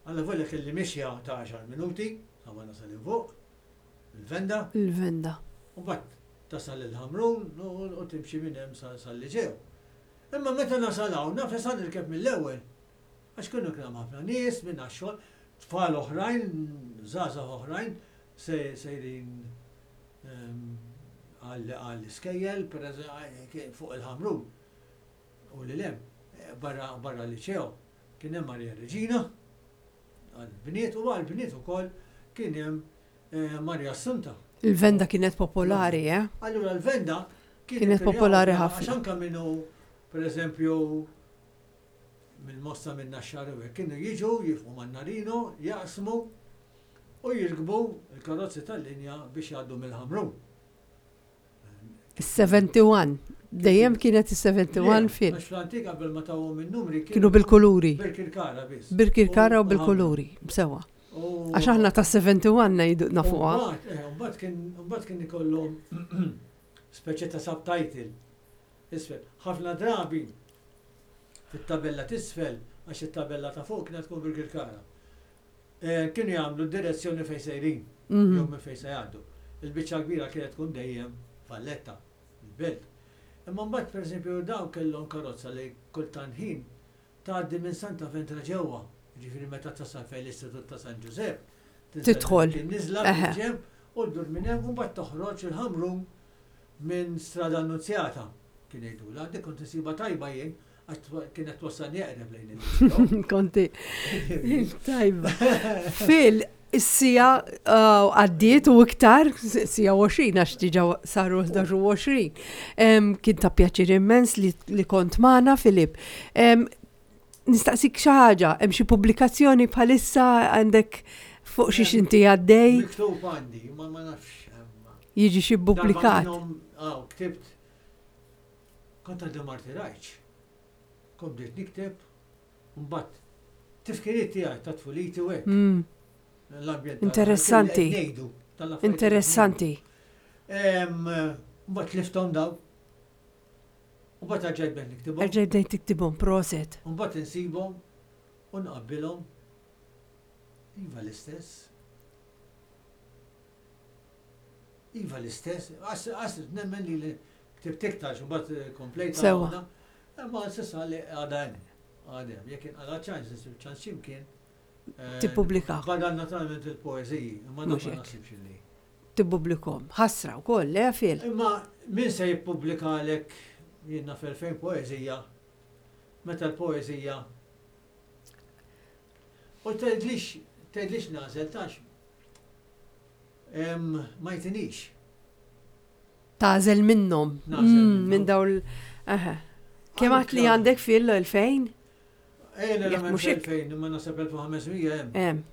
Alla volja kelli mixja ta' għaxar minuti, sa ma nasal 'il fuq, il-venda, Il-venda. u mbagħad tasal il-Ħamrun u u timxi minn hemm sa sal-Liċeo. Imma meta nasal hawn naf li sa nirkeb mill-ewwel. Għax kienu kien hemm ħafna nies minn għax-xogħol, tfal oħrajn, żgħażagħ oħrajn se sejrin ehm, għall għall-iskejjel, per eżempju, fuq il-Ħamrun. U li lem, barra barra l-Liċeo, kien hemm Maria Regina, għal-bniet u għal-bniet ukoll kien hemm eh, Maria Assunta. Il-venda kienet popolari, eh? Allura l-venda Kienet popolari ħafna. Għax anka minnu, per eżempju, mill-Mosta minn Naxxar u hekk, kienu jiġu, jieqfu man-Narino, jaqsmu u jirkbu il-karozzi tal-linja biex jgħaddu mill-Ħamrun. Is-sebgħa u sebgħin. Dejjem kienet is-sebgħa u sebgħin fil. Għax fl-antik qabel ma tawhom in-numri Kienu bil-kuluri. Birkirkara biss. Birkirkara u bil-kuluri. Sewa. U- Għax aħna ta' sebgħa u sebgħin ngħidu nafuha. Mbagħad, eh, mbagħad kien mbagħad kien ikollhom speċi ta' subtitle. Isfel, ħafna drabi fit-tabella t'isfel, għax it-tabella ta' fuq kienet tkun Birkirkara. Eh, Kienu jagħmlu direzzjoni fejn sejrin, Mhm. jew minn fejn se jgħaddu. Il-biċċa kbira kienet tkun dejjem Valletta, il-belt. Imma mbagħad pereżempju dawn kellhom karozza li kultant ħin tgħaddi minn Santa Ventra ġewwa, jiġifieri meta tasal fejn l-Istitut ta' San Ġużepp. tinżel Tidħol. Tinniżla Eħe. fil-ġenb u ddur minn hemm u mbagħad toħroġ il-Ħamrun minn Strada Annunzjata. Kien jgħidulha, dik kont insiba tajba jien għax twa- kienet twassalni eqreb lejn il Konti. Tajba. Fil, is-siegħa uh, għaddiet u iktar, siegħa għoxrin, għax diġà saru ħdax u għoxrin. Em, Kien ta' pjaċir immens li, li kont magħna, Filip. Em, Nistaqsik xi ħaġa, hemm xi pubblikazzjoni bħalissa għandek fuq xi inti għaddej, Miktub għandi, ma ma nafx. jiġi xi pubblikat. Aw, ktibt. Kont għaddi ma rtirajtx. Kont bdejt nikteb, mbagħad tifkiriet tiegħi ta' tfuliti u hekk. Mm, L-ambjent tal- Interessanti. qed ngħidu, tal-affarijiet Interessanti. Em, Mbagħad tlifthom daw. Mbagħad erġajt bdejt niktibhom. Erġaj bdejt tiktibhom, proset. Mbagħad insibhom u nqabbilhom. Iva l-istess. Iva l-istess. Għas għas nemmen li li ktibt iktar mbagħad komplejta. Sewa. waħda. Imma s'issa li għadha hemm. Għadha hemm. Jekk inqala ċans, insib ċans x'imkien. eh, Tippubblika. Badal naturalment il-poeżiji, imma Mhux dak ma hekk. naħsibx li. Tippubblikhom. Ħasra wkoll, le Fil? Imma min se jippubblika għalek jiena f'elfejn poeżija, meta l-poeżija. U tgħidlix, tgħidlix nagħżel tax. Em, Ma jtinix. Tagħżel minnhom. Nagħżel Mm, minnhom. Minn dawn l- Aha. Kemm għat li għandek fil elfejn? Ejna Jekk la mhux mhux hekk. elfejn, imma naħseb elf u ħames mija hemm. Hemm.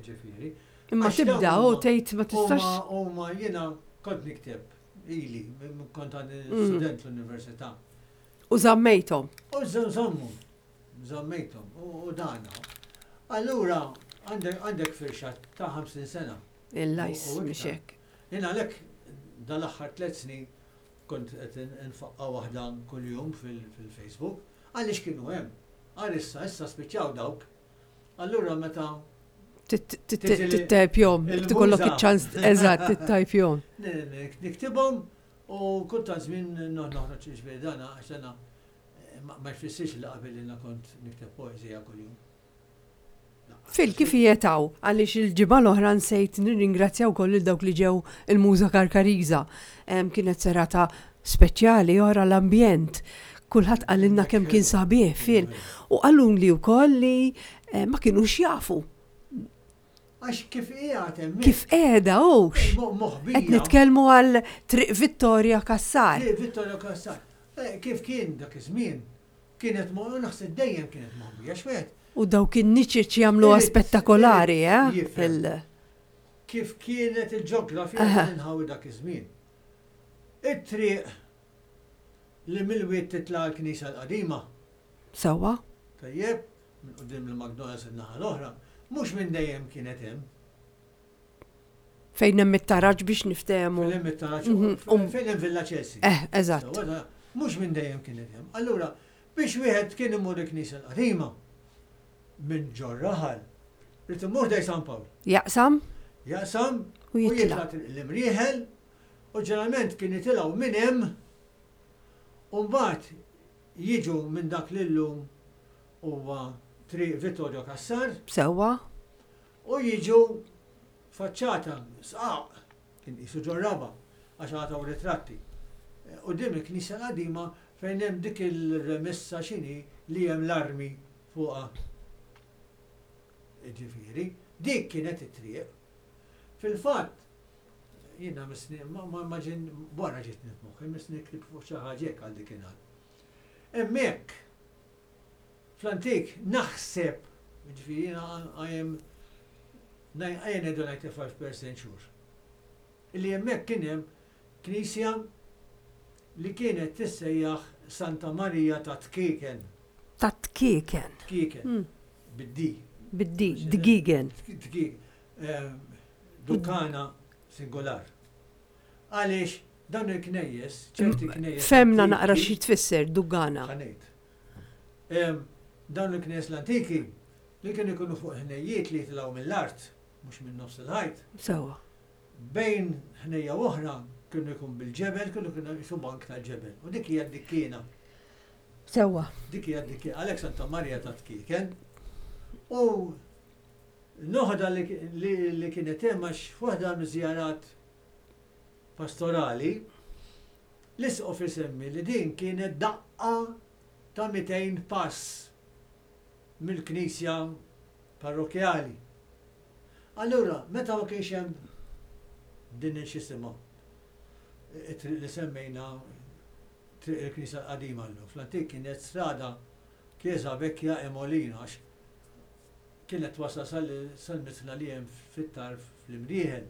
Ġifieri. Imma Għax tibda dawn u huma- tgħid ma tistax. Huma huma jiena kont nikteb ili, minn kont għandi Mm. student l-università. U żammejthom. U żammu, żammejthom, u u dana. Allura, għandek għandek firxa ta' ħamsin sena. Il-lajs U- u mhix iktar. hekk. Jien għalhekk dal-aħħar tliet snin kont qed nfaqqa waħda kuljum fil-Facebook, għaliex kienu hemm. Għal issa, issa spiċċaw dawk. Allura meta Tittajpjom, tikollok iċ-ċans, eżatt, tittajpjom. niktibhom u kultant żmien noħroġ ġifieri dana għax dana eh, ma ma jfissirx li qabel jiena kont nikteb poeżija kuljum. Fil, kif jietaw, għaliex il-ġimgħa l-oħra nsejt nirringrazzjaw koll il dawk li ġew il-Muża Karkariża. Em, Kienet serata speċjali ora l-ambjent. Kulħadd qalilna kemm kien sabiħ fil. U qalun li wkoll li eh, ma kinux jafu Għax kif qiegħed hemmhekk. kif qiegħda hux. Moħbija. Qed nitkellmu għal Triq Vittoria Cassar. Triq Vittorio Cassar. Eh, Kif kien dak iż-żmien? Kienet mo naħseb dejjem kienet moħbija xwed. U dawk in-niċeċ jagħmluha Irid- spettakolari, irid eh? jifhem. Fil- Kif kienet il-ġeografija Aha. tal-inħawi dak iż-żmien. It-triq li mill-wied titla' l-Knisja l-qadima, Sewwa? Tajjeb, minn quddiem il-McDonald's in-naħa l-oħra, mhux minn dejjem kienet hemm. Fejn hemm it-taraġ biex niftehmu. Fejn hemm it-taraġ, Mhm, um. fejn hemm Villa Chelsea. Eh, eżatt. Sewwa, da, mhux minn dejjem kienet hemm. Allura, biex wieħed kien imur il-Knisja l-qadima minn ġor-raħal, irid imur ħdejn San Pawl. Jaqsam Jaqsam u u jitla'. jitla' l-Imrieħel u ġeneralment kien jitilgħu minn hemm u mbagħad jiġu minn dak li llum huwa Triq Vittorio Cassar Sewwa? u jiġu faċċata sqaq kien qisu ġor-raba' għax għataw ritratti. U din il-knisja l-qadima fejn hemm dik il-remissa xini li hemm l-armi fuqha. Ġifieri, dik kienet it-triq. Fil-fatt, jiena misni, ma ma ma ġin, wara ġiet f'moħħi, misni ktib fuq xi ħaġa hekk għal dikinhar. Hemmhekk, fl-antik, naħseb, ġifieri jiena I am I am ninety-five percent sure. Illi hemmhekk kien hemm knisja li kienet tissejjaħ Santa Maria ta' Tkieken. Ta' Tkieken. Tkieken. Mm. Bid-D. Bid-D, Dgigen. Tkieken. Dukana singolar. Għaliex dawn il-knejjes, ċerti knejjes. Fehmna antiki- naqra xi tfisser Dugana. Ħa ngħid. Em, Dawn il-knejjes l-antiki li kienu jkunu fuq ħnejjiet li jitilgħu mill-art, mhux minn nofs il-ħajt. Sewwa. Bejn ħnejja oħra kienu jkun bil-ġebel, kienu kienu jisu bank tal-ġebel. U dik hija d-dikkiena. Sewwa. Dik hija d-dikkiena. Għalhekk Santa Maria ta' Tkieken. U noħda li, li, li kienet hemm għax f'waħda miż-żjarat pastorali, l-isqof isemmi li din kienet daqqa ta' mitejn pass mill-knisja parrokjali. Allura, meta ma kienx hemm din il-xisima, it-triq li semmejna, triq il-knisja qadima llum, fl-antik kienet strada Chiesa Vecchia e Molino, għax kienet wasal sal-mitħna li hemm fit-tarf fl-Imrieħel.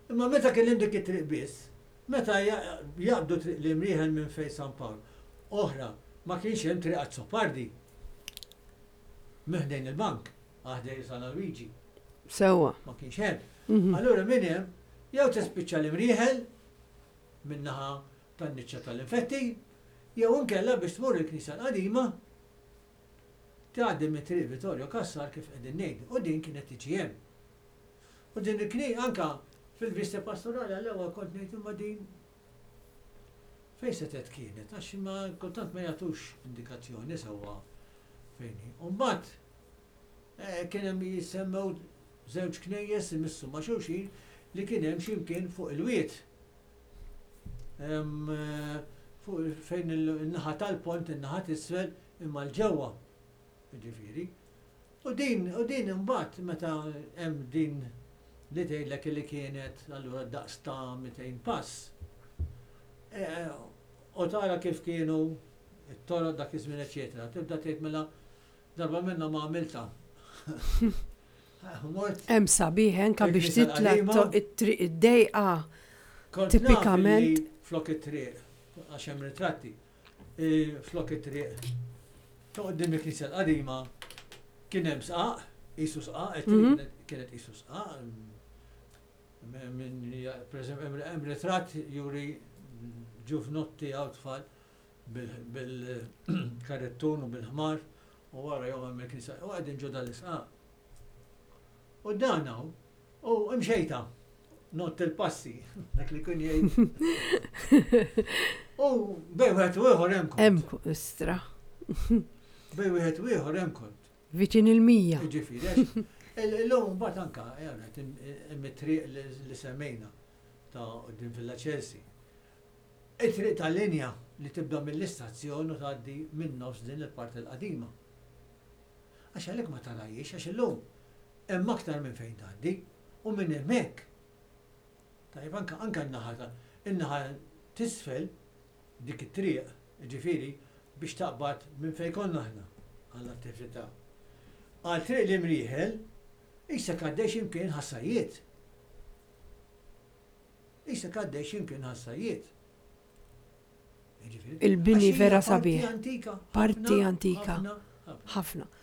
Imma meta kien hemm dik it-triq biss, meta jaqbdu triq l-Imrieħel minn fejn San Pawl, oħra, ma kienx hemm triq Azzopardi. Minn ħdejn il-bank, ħdejn San Luigi. Sewwa. Ma kienx hemm. Mhm. Allura minn hemm jew tispiċċa l-Imrieħel min-naħa tan-niċċa tal-infetti, jew inkella biex tmur il-knisja l-qadima tgħaddi minn triq Vittorio Cassar kif qegħdin ngħidu, u din kienet tiġi hemm. U din il-kni anka fil-vista pastorali għall-ewwel kont ngħid, imma din fejn setet kienet, għax ma kultant ma jagħtux indikazzjoni sewwa fejn hi. U mbagħad eh, kien hemm jisemmew żewġ knejjes imissu ma' xulxin li kien hemm x'imkien fuq il-wied. Em, eh, Fuq fejn il-naħa tal-pont, in-naħa t'isfel, imma l-ġewwa. Ġifieri. U din, u din imbagħad meta hemm din li tgħidlek li kienet allura daqs ta' mitejn pass. Eh, U tara kif kienu it-toroq dak iż-żmien, eċetera. Tibda tgħid, mela darba minna ma għamilta. Mort Hemm sabiħ anka biex Il-knisja titla' l-qadima. to- it-triq id-dejqa. Kont naf Tipikament. illi flok it-triq, għax hemm ritratti, eh, flok it-triq ta' quddiem il-knisja l-qadima kien hemm sqaq, qisu sqaq, it-triq Mhm. kienet- kienet qisu sqaq. mm, Min, per eżempju, hemm- hemm ritratt juri ġuvnotti għaw tfal bil-karettun u bil-ħmar u wara jom hemm il-knisja u qegħdin ġo dal-isqaq. U dan hawn, u imxejta, not il-passi, dak li kun jgħid. U bejn wieħed u ieħor hemm kont. Hemm istra. Bejn wieħed u ieħor hemm kont. Viċin il-mija. Ġifieri, għax illum mbagħad anka hemm it-triq li li semmejna ta' quddiem Villa Chelsea. It-triq tal-linja li tibda mill-istazzjon u tgħaddi minn nofs din il-parti l-qadima. Għax għalhekk ma tarajiex, għax illum hemm aktar minn fejn tgħaddi u minn hemmhekk. Tajjeb, anka anka n-naħa ta' in-naħa t'isfel dik it-triq, ġifieri biex taqbad minn fejn konna aħna. għall-attività. Għal Triq l-Imrieħel, issa għaddej x'imkien Ħa Sajjied. Issa għaddej x'imkien Ħa Sajjied. Jiġifieri, Il-bini għax hija vera parti sabiħ. antika. Parti ħafna, antika. ħafna, ħafna, Ħafna. ħafna.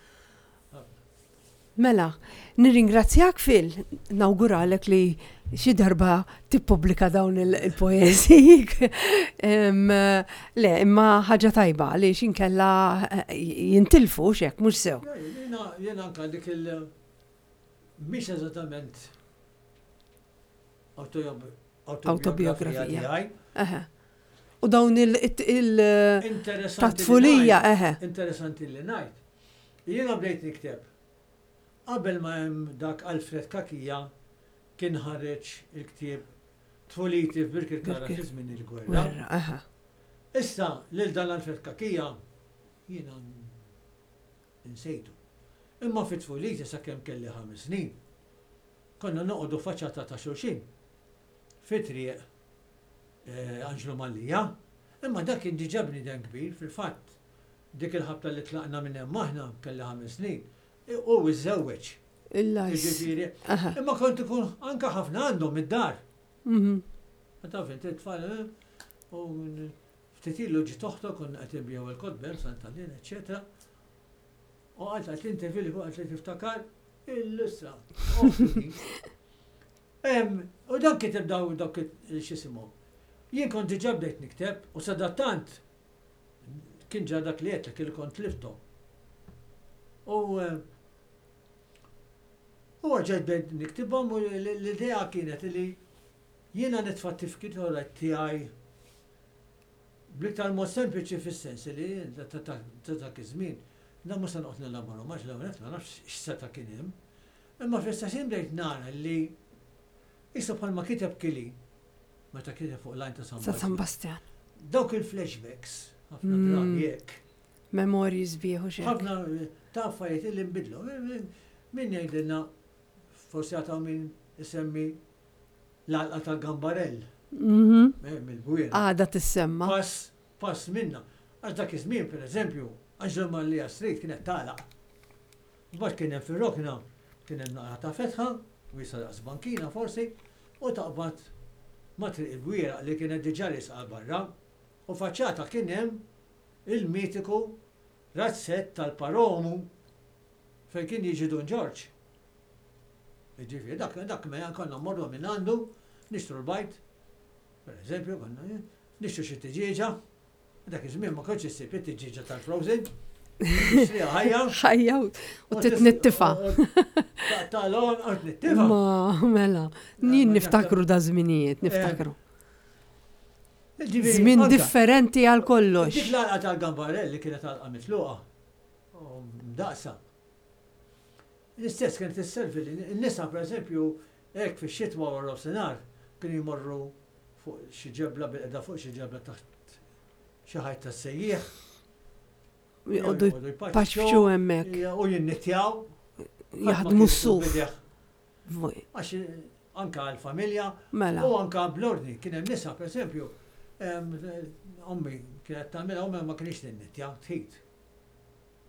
Mela, nirringrazzjak Phil, nawguralek li xi darba tippubblika dawn il- il-poeżiji. Em, Le, imma ħaġa tajba li inkella eh, jintilfu xek, mhux sew. Ja, Jiena jiena anka dik il- mhix eżattament autobio- Autobiografija. autobiografija tiegħi. Eħe. U dawn il- il- Interessanti ta' li tfulija, ngħid- eħe. Interessanti li ngħid. Jiena bdejt nikteb. Qabel ma hemm dak Alfred Cachia kien ħareġ il-ktieb Tfuliti f'Birkirkara Birkir- fi żmien il-gwerra. Werra, eħe. Issa lil dan Alfred Cachia jiena insejtu. Imma fi tfuliti sakemm kelli ħames snin. Konna noqogħdu faċċata ta' xulxin. Fi triq eh, Anġlu Mallia, imma dak kien diġà bniedem kbir, fil-fatt dik il-ħabta li tlaqna minn hemm aħna kelli ħames snin, u iżżewweġ. Il-lajs. Jiġifieri, Eħe. imma kont ikun anka ħafna għandhom id-dar. Mhm. Ma taf inti t-tfal, eh, u ftit ilu ġiet oħtu konna qed inbigħu il-kotba Sant'Alin, eċetera. U għalt għalt interview li għalt li tiftakar il-issa. Em, U dan kiteb daw dawk x'isimhom. Jien kont diġà bdejt nikteb u sadattant kien ġa dak li għedtlek li kont tlifthom. U eh, u għaġġajt bdejt niktibhom u l- l-idea kienet li jiena nitfa' tifkira tiegħi bl-iktar mod sempliċi fis-sens li ta' ta' ta' dak iż-żmien da mhux se noqgħod nelaboru għax l-ewwel ma nafx x'seta' kien hemm. Imma fl-istess ħin bdejt nara li issa bħalma kiteb Kili meta kiteb fuq l-Għajn ta' San Sa' San Bastjan. Bastian. Dawk il-flashbacks, ħafna Mm. drabi hekk. Memorji sbieħ u xek. ħafna ta' affarijiet li nbidlu. Min jgħidilna forsi għataw min isemmi l-għalqa tal-Gambarell Mhm. eh, mill-Bwiera. Għada tissemma. Pass, pass minna. Għax dak iż-żmien, per eżempju, Anġlu Mallia Street kienet tagħlaq. Mbagħad kien hemm fir-rokna, kien hemm naqra ta' fetħa, wiesa daqs bankina forsi, u taqbad ma' Triq il-Bwiera li kienet diġà risqa barra, u faċċata kien hemm il-mitiku razzett tal-Paromu fejn kien jiġi Dun Ġorġ. Jiġifieri dak dak mela konna mmorru minn għandu, nixtru l-bajd, per eżempju, konna eh, nixtru xi tiġieġa, dak iż-żmien ma kontx issib it-tiġieġa tal-frozen, tixtriha ħajja. Ħajja u titnittifa. Tal-on, u tnittifa. Ma, mela, jien niftakru da żminijiet, niftakru. Ġifieri, Żmien anka, differenti għal kollox. Dik l-għalqa tal-Gambarell li kienet għalqa mitluqa, u mdaqsa. L-istess kienet isservi li n-nisa per eżempju, hekk fix-xitwa wara nofsinhar kienu jmorru fuq xi ġebla bil-qeda fuq xi ġebla taħt xi ħajt tas-sejjieħ. Joqogħdu jpaċċu hemmhekk, U jinnittjaw. jaħdmu s-suf. Għax anka għal-familja Mela, u anka bl-ordni. Kien hemm nisa, per eżempju, em, ommi kienet tagħmilha, ommi ma kienx tinnittja, tħit.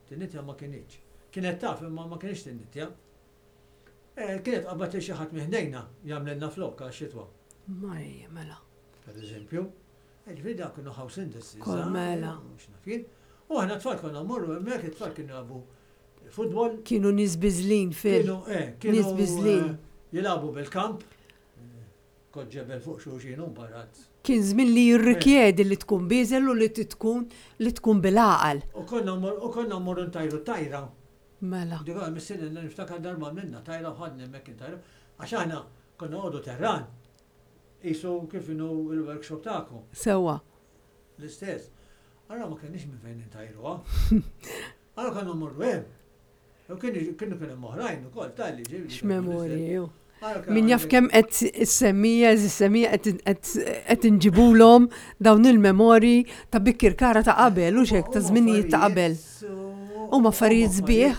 Tinnittja ma kienx. Kienet taf imma ma kienx tinnittja. Eh, Kienet qabad li xi ħadd minn ħdejna jagħmlilna flokk għal xitwa, Marija, mela. per eżempju. Ġifieri dak kienu house industries. Kol mela. U aħna tfal konna mmorru hemmhekk, it-tfal kienu jilagħbu futbol, Kienu nies biżlin fil. Kienu, eh, kienu Nies biżlin. eh, jilagħbu bil-kamp, eh, kod ġebel fuq xulxin u barat. Kien żmien li jirrikjedi li tkun biżel u li tkun li tkun bil-għaqal. U konna mmor- u konna mmorru ntajru tajra. Mela. Dik għal missieri niftakar darba minna tajra u ħadna hemmhekk intajru. Għax aħna konna għodu terran. Isu kif inhu il-workshop tagħkom. Sewwa. L-istess. Allora ma kenniex minn fejn intajruha. Allora konna mmorru hemm. U kienu kienu kien hemm oħrajn ukoll tal-li ġieli. X'memorji. ju. Allora kien Min jaf għandek- kemm qed issemmija, issemmija qed qed inġibulhom dawn il-memorji ta' Birkirkara ta' qabel u xek ta' żminijiet ta' qabel. Huma affarijiet sbieħ.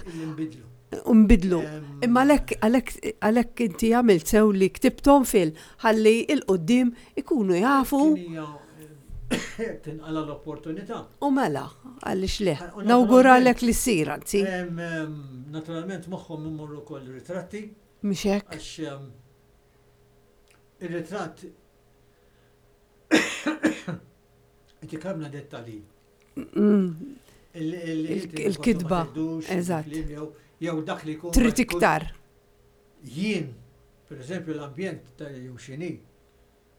U nbidlu. Imma għalhekk għalhekk għalhekk inti għamilt sew li ktibthom fil ħalli il-qudiem ikunu jafu. Kien hija, eh, Tinqala l-opportunità. U mela, għaliex le. U Nawguralek li ssir, anzi. Em, em, Naturalment magħhom imorru wkoll ritratti Mhux hekk? għax em, ir-ritratt inti kamna dettalji. Mm, Il- il- Il- inti il-kitba, forsi ma tgħidux, eżatt. il-kliem Jew jew dak li jkun. Trid iktar. Jien, per eżempju, l-ambjent ta' jew xini,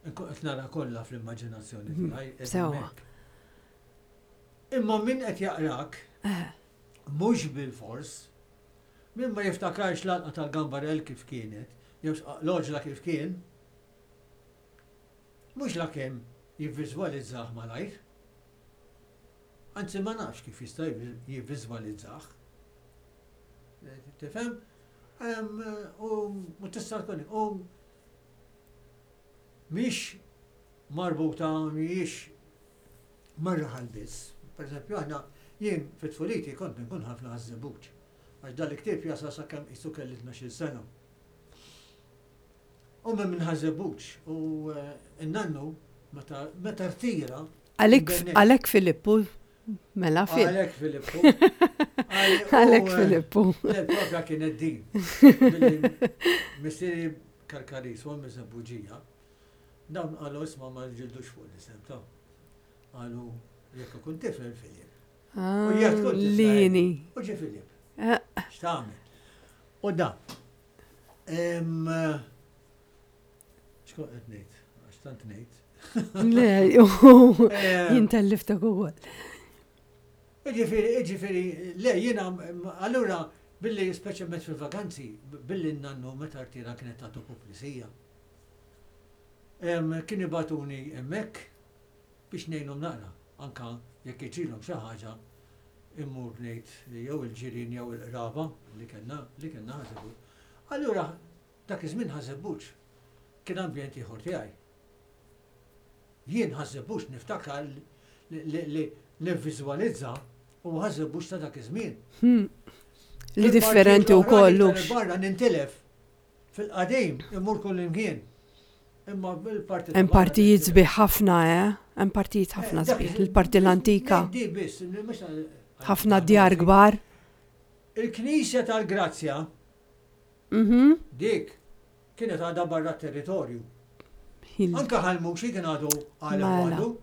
nkun qed nara kollha fl-immaġinazzjoni Mhm, tiegħi. qed Sewwa. hemmhekk. Imma min qed jaqrak, Eh, mhux bil-fors, min ma jiftakarx l-għalqa tal-gambarel kif kienet, jew l-oġla kif kien, mhux la kemm jivviżwalizzah malajr. Anzi ma nafx kif jista' jivviżwalizzah. Eh, Tifhem? Em, U u tista' tkun u mhix marbuta mhijiex mar-raħal biss. Per eżempju, aħna jien fit-tfuliti kont nkun ħafna Ħaż-Żebbuġ. Għax dal-ktieb jasal sakemm qisu kelli tnax-il sena. U minn minn Ħaż-Żebbuġ u eh, n-nannu meta meta rtira. Għalek Bennet. għalek Filippu, mela Fil. Għalek Filippu. Għalek U, eh, Filippu. Le, propja kienet din. Billi Missieri Karkaris, u Żebbuġija, dawn qalu isma' ma ġildux fuq l-isem ta' qalu jekk ikun tifel Filip. Ah, U jekk tkun tifla Lini. U ġie Filip. Eh, X'tagħmel? U da. Em, X'kont qed ngħid? Għax tant ngħid. Le, Em, jien telliftek ukoll. Iġifieri, iġifieri, le, jiena, allura, billi speċjalment fil-vaganzi, billi n-nannu meta rtira kienet tagħtu puplisija. Em, Kien jibagħtuni hemmhekk biex ngħinhom naqra, anka jekk jiġrilhom xi ħaġa immur ngħid jew il-ġirien jew il-qraba li kellna li kellna Ħaż-Żebbuġ. Allura dak iż-żmien Ħaż-Żebbuġ kien ambjent ieħor tiegħi. Jien Ħaż-Żebbuġ niftakar li- li li nivviżwalizza u Ħaż-Żebbuġ ta' dak iż-żmien. Hmm. Li differenti u kollux. Barra nintilef fil-qadim immur kull imkien. Imma bil-parti Hemm partijiet sbieħ ħafna, eh? Hemm partijiet ħafna sbieħ. Il-parti l-antika, Di biss, mhux ħafna djar kbar. Il-Knisja tal-Grazzja Mhm. dik kienet għadha barra territorju. Il- Anka Ħal Muxi kien għadu għala Mela. għadu.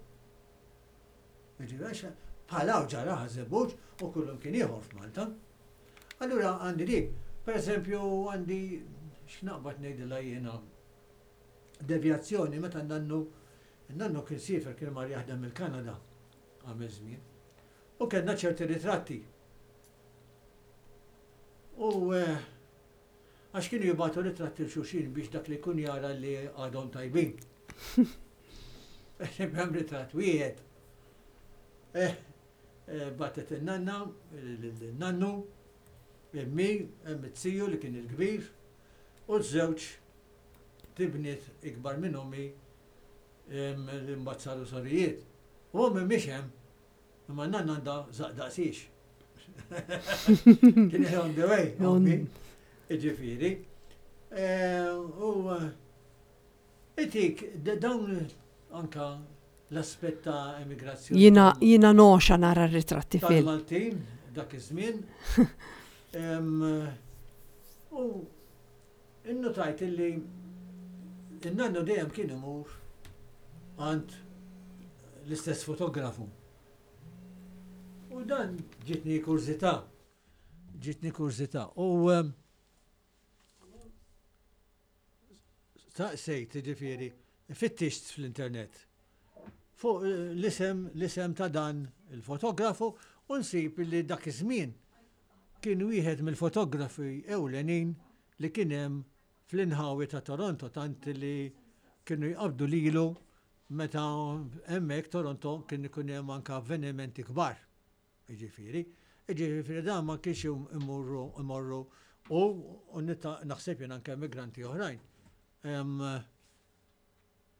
Jiġifieri, bħala ġara Ħaż-Żebbuġ u kullum kien ieħor f'Malta. Allura għandi dik, per eżempju għandi x'naqbad ngħidilha jiena devjazzjoni meta nannu nannu kien siefer kien mar jaħdem il-Kanada għamel żmien. U kellna ċerti ritratti. U eh, għax kienu jibagħtu ritratti 'l xulxin biex dak li jkun jara li għadhom tajbin. Hemm ritratt wieħed. Eh, eh, bagħtet il-nanna, il-nannu, immi, hemm it-ziju li kien il-kbir, u żewġ tibniet ikbar minn ommi em, li mbagħad saru sorijiet. U ommi mhix hemm, imma n-nanna għandha żaqq daqsix. Kien on the way, ommi. Iġifieri. Eh, U eh, itik, d- dawn anka l-aspett ta' emigrazzjoni. Jiena jiena noxa nara r-ritratti fil. Tal-Maltin, dak iż-żmien. Em, U innotajt illi il-nannu dejjem kien imur għand l-istess fotografu. U dan ġitni kurżità. Ġitni kurżità. U em, staqsejt, ġifieri, fittixt fl-internet fuq eh, l-isem l-isem ta' dan il-fotografu u nsib li dak iż-żmien kien wieħed mill-fotografi ewlenin li kien hemm fl-inħawi ta' Toronto tant li kienu jqabdu lilu meta hemmhekk Toronto kien ikun hemm anke avvenimenti kbar. Jiġifieri, jiġifieri dan ma kienx imorru imorru u u nita- naħseb jien anke immigranti oħrajn. Em,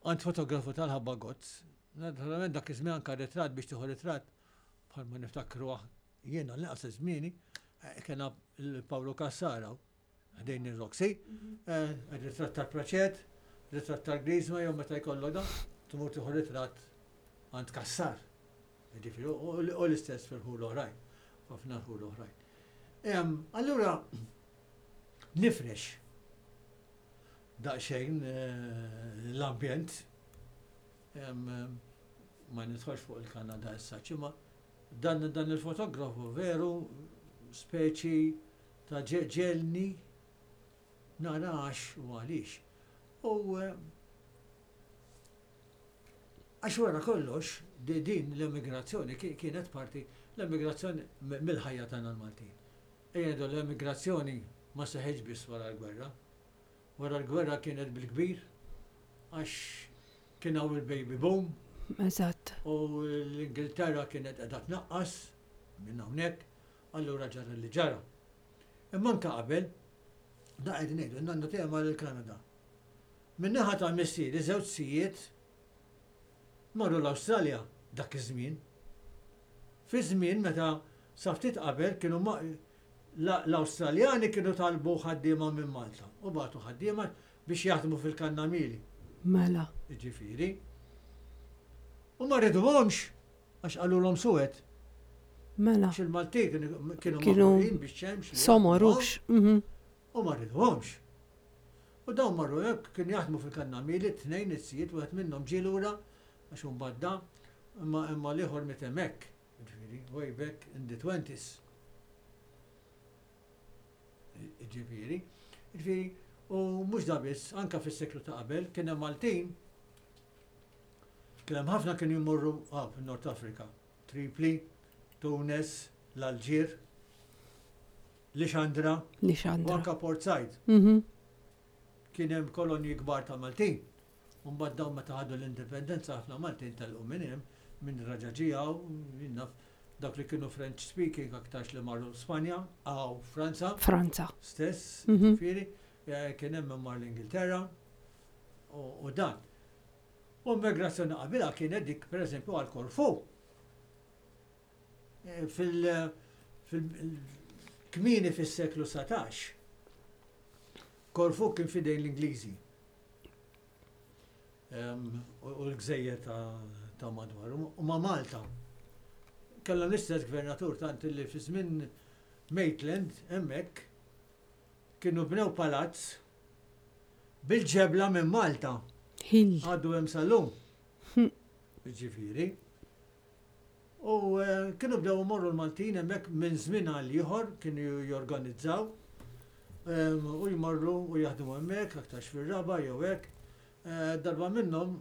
Għand fotografu tal-ħabba gozz. Naturalment dak iż-żmien anke ritratt biex tieħu ritratt bħalma niftakru jiena l-inqas żmieni eh, kien il-Pawlu Cassara ħdejn ir-Roxy, eh, ritratt tal-Praċet, ritratt tal-Griżma jew meta jkollok da, tmur tieħu ritratt Għand Cassar. Ġifieri, u l-istess fil-ħul oħrajn, ħafna ħul oħrajn. Allura, nifrex daqsxejn eh, l-ambjent, ma nidħolx fuq il-Kanada issa, imma dan, dan il-fotografu veru speċi ta' ġegħelni narax u għaliex. U eh, għax wara kollox, din l-emigrazzjoni kienet parti l-emigrazzjoni mill-ħajja tagħna l-Maltin. Ejja l-emigrazzjoni ma seħħitx biss wara l-gwerra. Wara l-gwerra kienet bil-kbir, għax kien hawn il-baby boom. Eżatt. U l-Ingilterra kienet qiegħda tnaqqas minn hawnhekk, allura ġara li ġara. Imma anke qabel, da qed ngħidu, nannu tiegħi l-Kanada. Min-naħa ta' missieri żewġ zijiet marru l-Awstralja dak iż-żmien. Fi żmien meta sa ftit qabel kienu l-Awstraljani kienu talbu ħaddiema minn Malta u bagħtu ħaddiema biex jaħdmu fil-kannamili. Mela. Ġifieri. U ma riduhomx għax qalulhom suwed. Mela. Għax il-Malti kienu kienu biex xemx. Somorux. Mhm. U ma riduhomx. U dawn marru hekk kienu jaħdmu fil-kannamili tnejn it-sijiet wieħed minnhom ġie lura għax badda imma imma l-ieħor miet hemmhekk. Ġifieri, way back in the twenties. Ġifieri, ġifieri, u mhux da biss, anka fis-seklu ta' qabel kien hemm Maltin, kien hemm ħafna kienu jmorru ah, fin-Nord Afrika, Tripli, Tunis, l-Alġir, Lixandra, Lixandra. U anka Port Said. Mhm. Kien hemm kolonji kbar ta' Maltin. U mbagħad dawn meta ħadu l-indipendenza ħafna Maltin telqu minn hemm, minn raġaġija u naf dak li kienu French speaking aktarx li marru Spanja, għaw Franza. Franza. Stess, Mhm. ġifieri, eh, kien hemm min mar l-Ingilterra u u dan. U migrazzjoni qabilha kienet dik pereżempju għal Korfu. Eh, Fil- fil-kmieni fis-seklu satax, Korfu kien fidejn l-Ingliżi. Em, U u l-gżejjer ta' ta' madwar. U ma' Malta. Kellhom l-istess gvernatur tant li fi żmien Maitland hemmhekk kienu bnew palazz bil-ġebla minn Malta. Ħil. Għadu hemm sal-lum. Ġifieri. U eh, kienu bdew imorru l-Maltin hemmhekk minn żmien għal ieħor kienu jorganizzaw em, u jmorru u jaħdmu hemmhekk aktarx fir-raba' jew hekk. Eh, Darba minnhom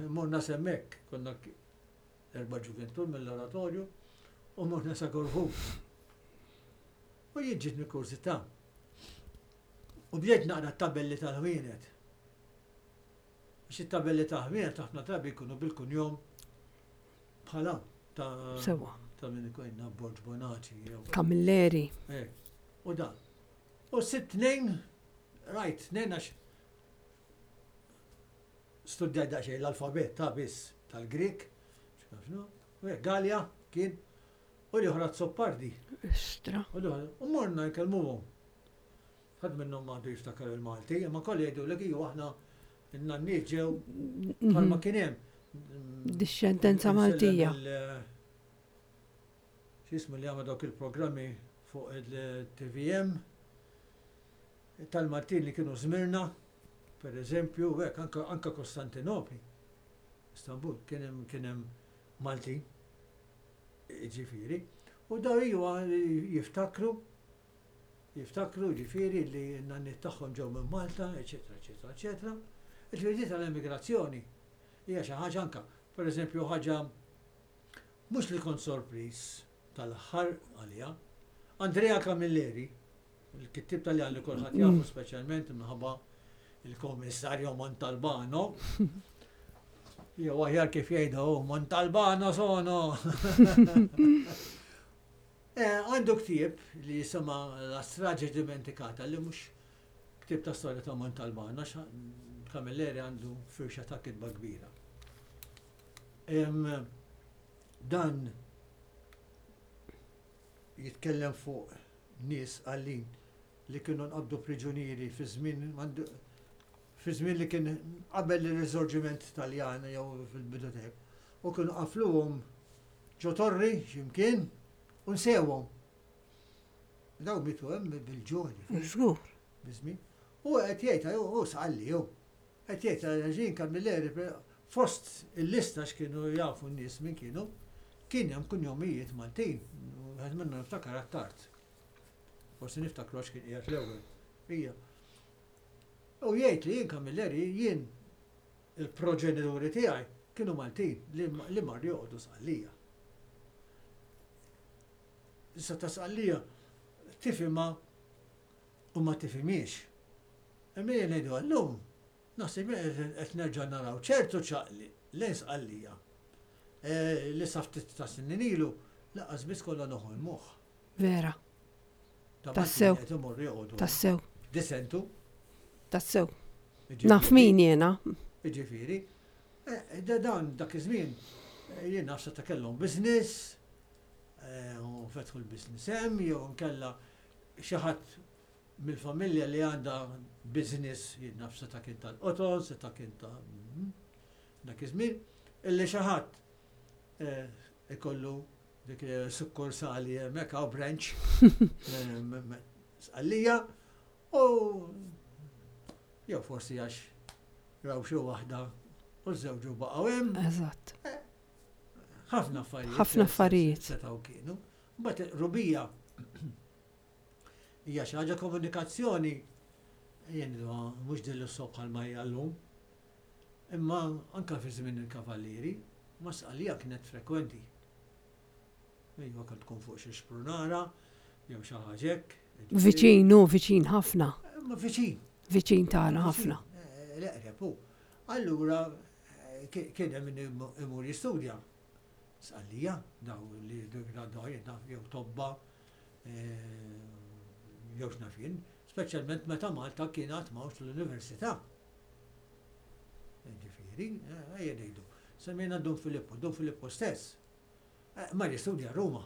morna s'hemmhekk, konna k- erba' ġuventur mill-oratorju u morna sa Korfu. U jien ġietni kurżità. U bdejt naqra t-tabelli tal-ħwienet. Għax it-tabelli tal-ħwienet ħafna drabi jkunu bil-kunjom bħala ta' Sewa. ta' min ikun Borg Bonaci jew Camilleri. Eh, u dan. U sitt tnejn, rajt tnejn għax studjajt daqsxejn l-alfabet ta' biss tal-Grek, x'naf u hekk, Gallia kien, u l-oħra Zoppardi. Istra. U l-oħra, u morna nkellmuhom. Ħadd minnhom m'għandu jiftakar il-Malti, imma kollha jgħidu li iju aħna n-nanniet ġew bħalma kien hemm. Dixxendenza Maltija. X'ismu li għamel dawk il-programmi fuq il-T V M tal-Maltin li kienu Zmirna, per eżempju, hekk anka, anka Kostantinopli, Istanbul, kien hemm kien hemm Maltin, ġifieri, u daw iwa jiftakru, jiftakru ġifieri li n-nanniet tagħhom ġew minn Malta, eċetera, eċetera, eċetera. Il-ġifieri tal-emigrazzjoni hija xi ħaġa anka, per eżempju, ħaġa mhux li kont sorpriż tal-aħħar għalija, Andrea Camilleri, il-kittib Taljan li kulħadd jafu speċjalment minħabba il-Komissarju Montalbano, jew aħjar kif jgħidu Montalbano sono. Eh, Għandu ktieb li jisema La strage dimenticata li mhux ktieb ta' storja ta' Montalbano, għax Camilleri għandu firxa ta' kitba kbira. Em, Dan jitkellem fuq nies għallin li kienu nqabdu priġunieri fi żmien fi żmien li kien qabel il-riżorġiment Taljan jew fil-bidu tiegħek. U kienu qafluhom ġo torri x'imkien u nsewhom. Daw mietu hemm bil-ġuħ, Żgur. biżmin. U qed jgħid, u Sqalli hu. Qed jgħid Jean Camilleri fost il-lista x'kienu jafu n-nies min kienu, kien hemm kunjomijiet Maltin. U Wieħed minnhom niftakar Attard. Forsi niftakru għax kien qiegħed l-ewwel. Ija. U jgħid li jien Camilleri jien il-proġenituri tiegħi kienu Maltin li, li marru joqogħdu Sqallija. Issa ta' Sqallija tifhimha u ma tifhimiex. Imma jien ngħidu għallum, naħseb qed nerġa' naraw ċertu ċaqli lejn Sqallija eh, li sa ftit ta' snin ilu lanqas biss kollha noħolmuh. Vera. Ta' Tassew. Maltin qed imorru joqogħdu. Tassew. Disentu. Tassew. Jiġifieri- Naf min jiena. Jiġifieri, eh, da dan dak iż-żmien eh, jien naf ta' kellhom business, eh, u fetħu l-business hemm, jew nkella xi ħadd mill-familja li għandha business, jien naf seta' kien tal-qoton, seta' kien ta' mm, dak iż-żmien, illi xi ħadd eh, ikollu dik sukkursali hemmhekk hawn branch eh, m- m- Sqallija u jew forsi għax raw xi waħda u żewġu baqgħu hemm. Eżatt. Ħafna affarijiet. Ħafna affarijiet. Setgħu kienu. Mbagħad rubija hija xi ħaġa komunikazzjoni jien mhux din l bħalma hija llum. Imma anka fi żmien il-kavallieri, ma Sqallija kienet frekwenti. Ejwa kan tkun fuq xi xprunara, jew xi ħaġa hekk. Viċin, u viċin ħafna. Ma viċin. Viċin tagħna ħafna. Eh, L-eqreb hu. Allura eh, ki- kien hemm min imu- imur jistudja. Sqallija, daw li gradwaw jew tobba, eh, jew x'naf jien, speċjalment meta Malta kien għad m'hawnx l-università. Ġifieri, eh, ejja ngħidu. Semmejna Dun Filippo, Dun Filippo stess. eh, Mar jistudja Ruma.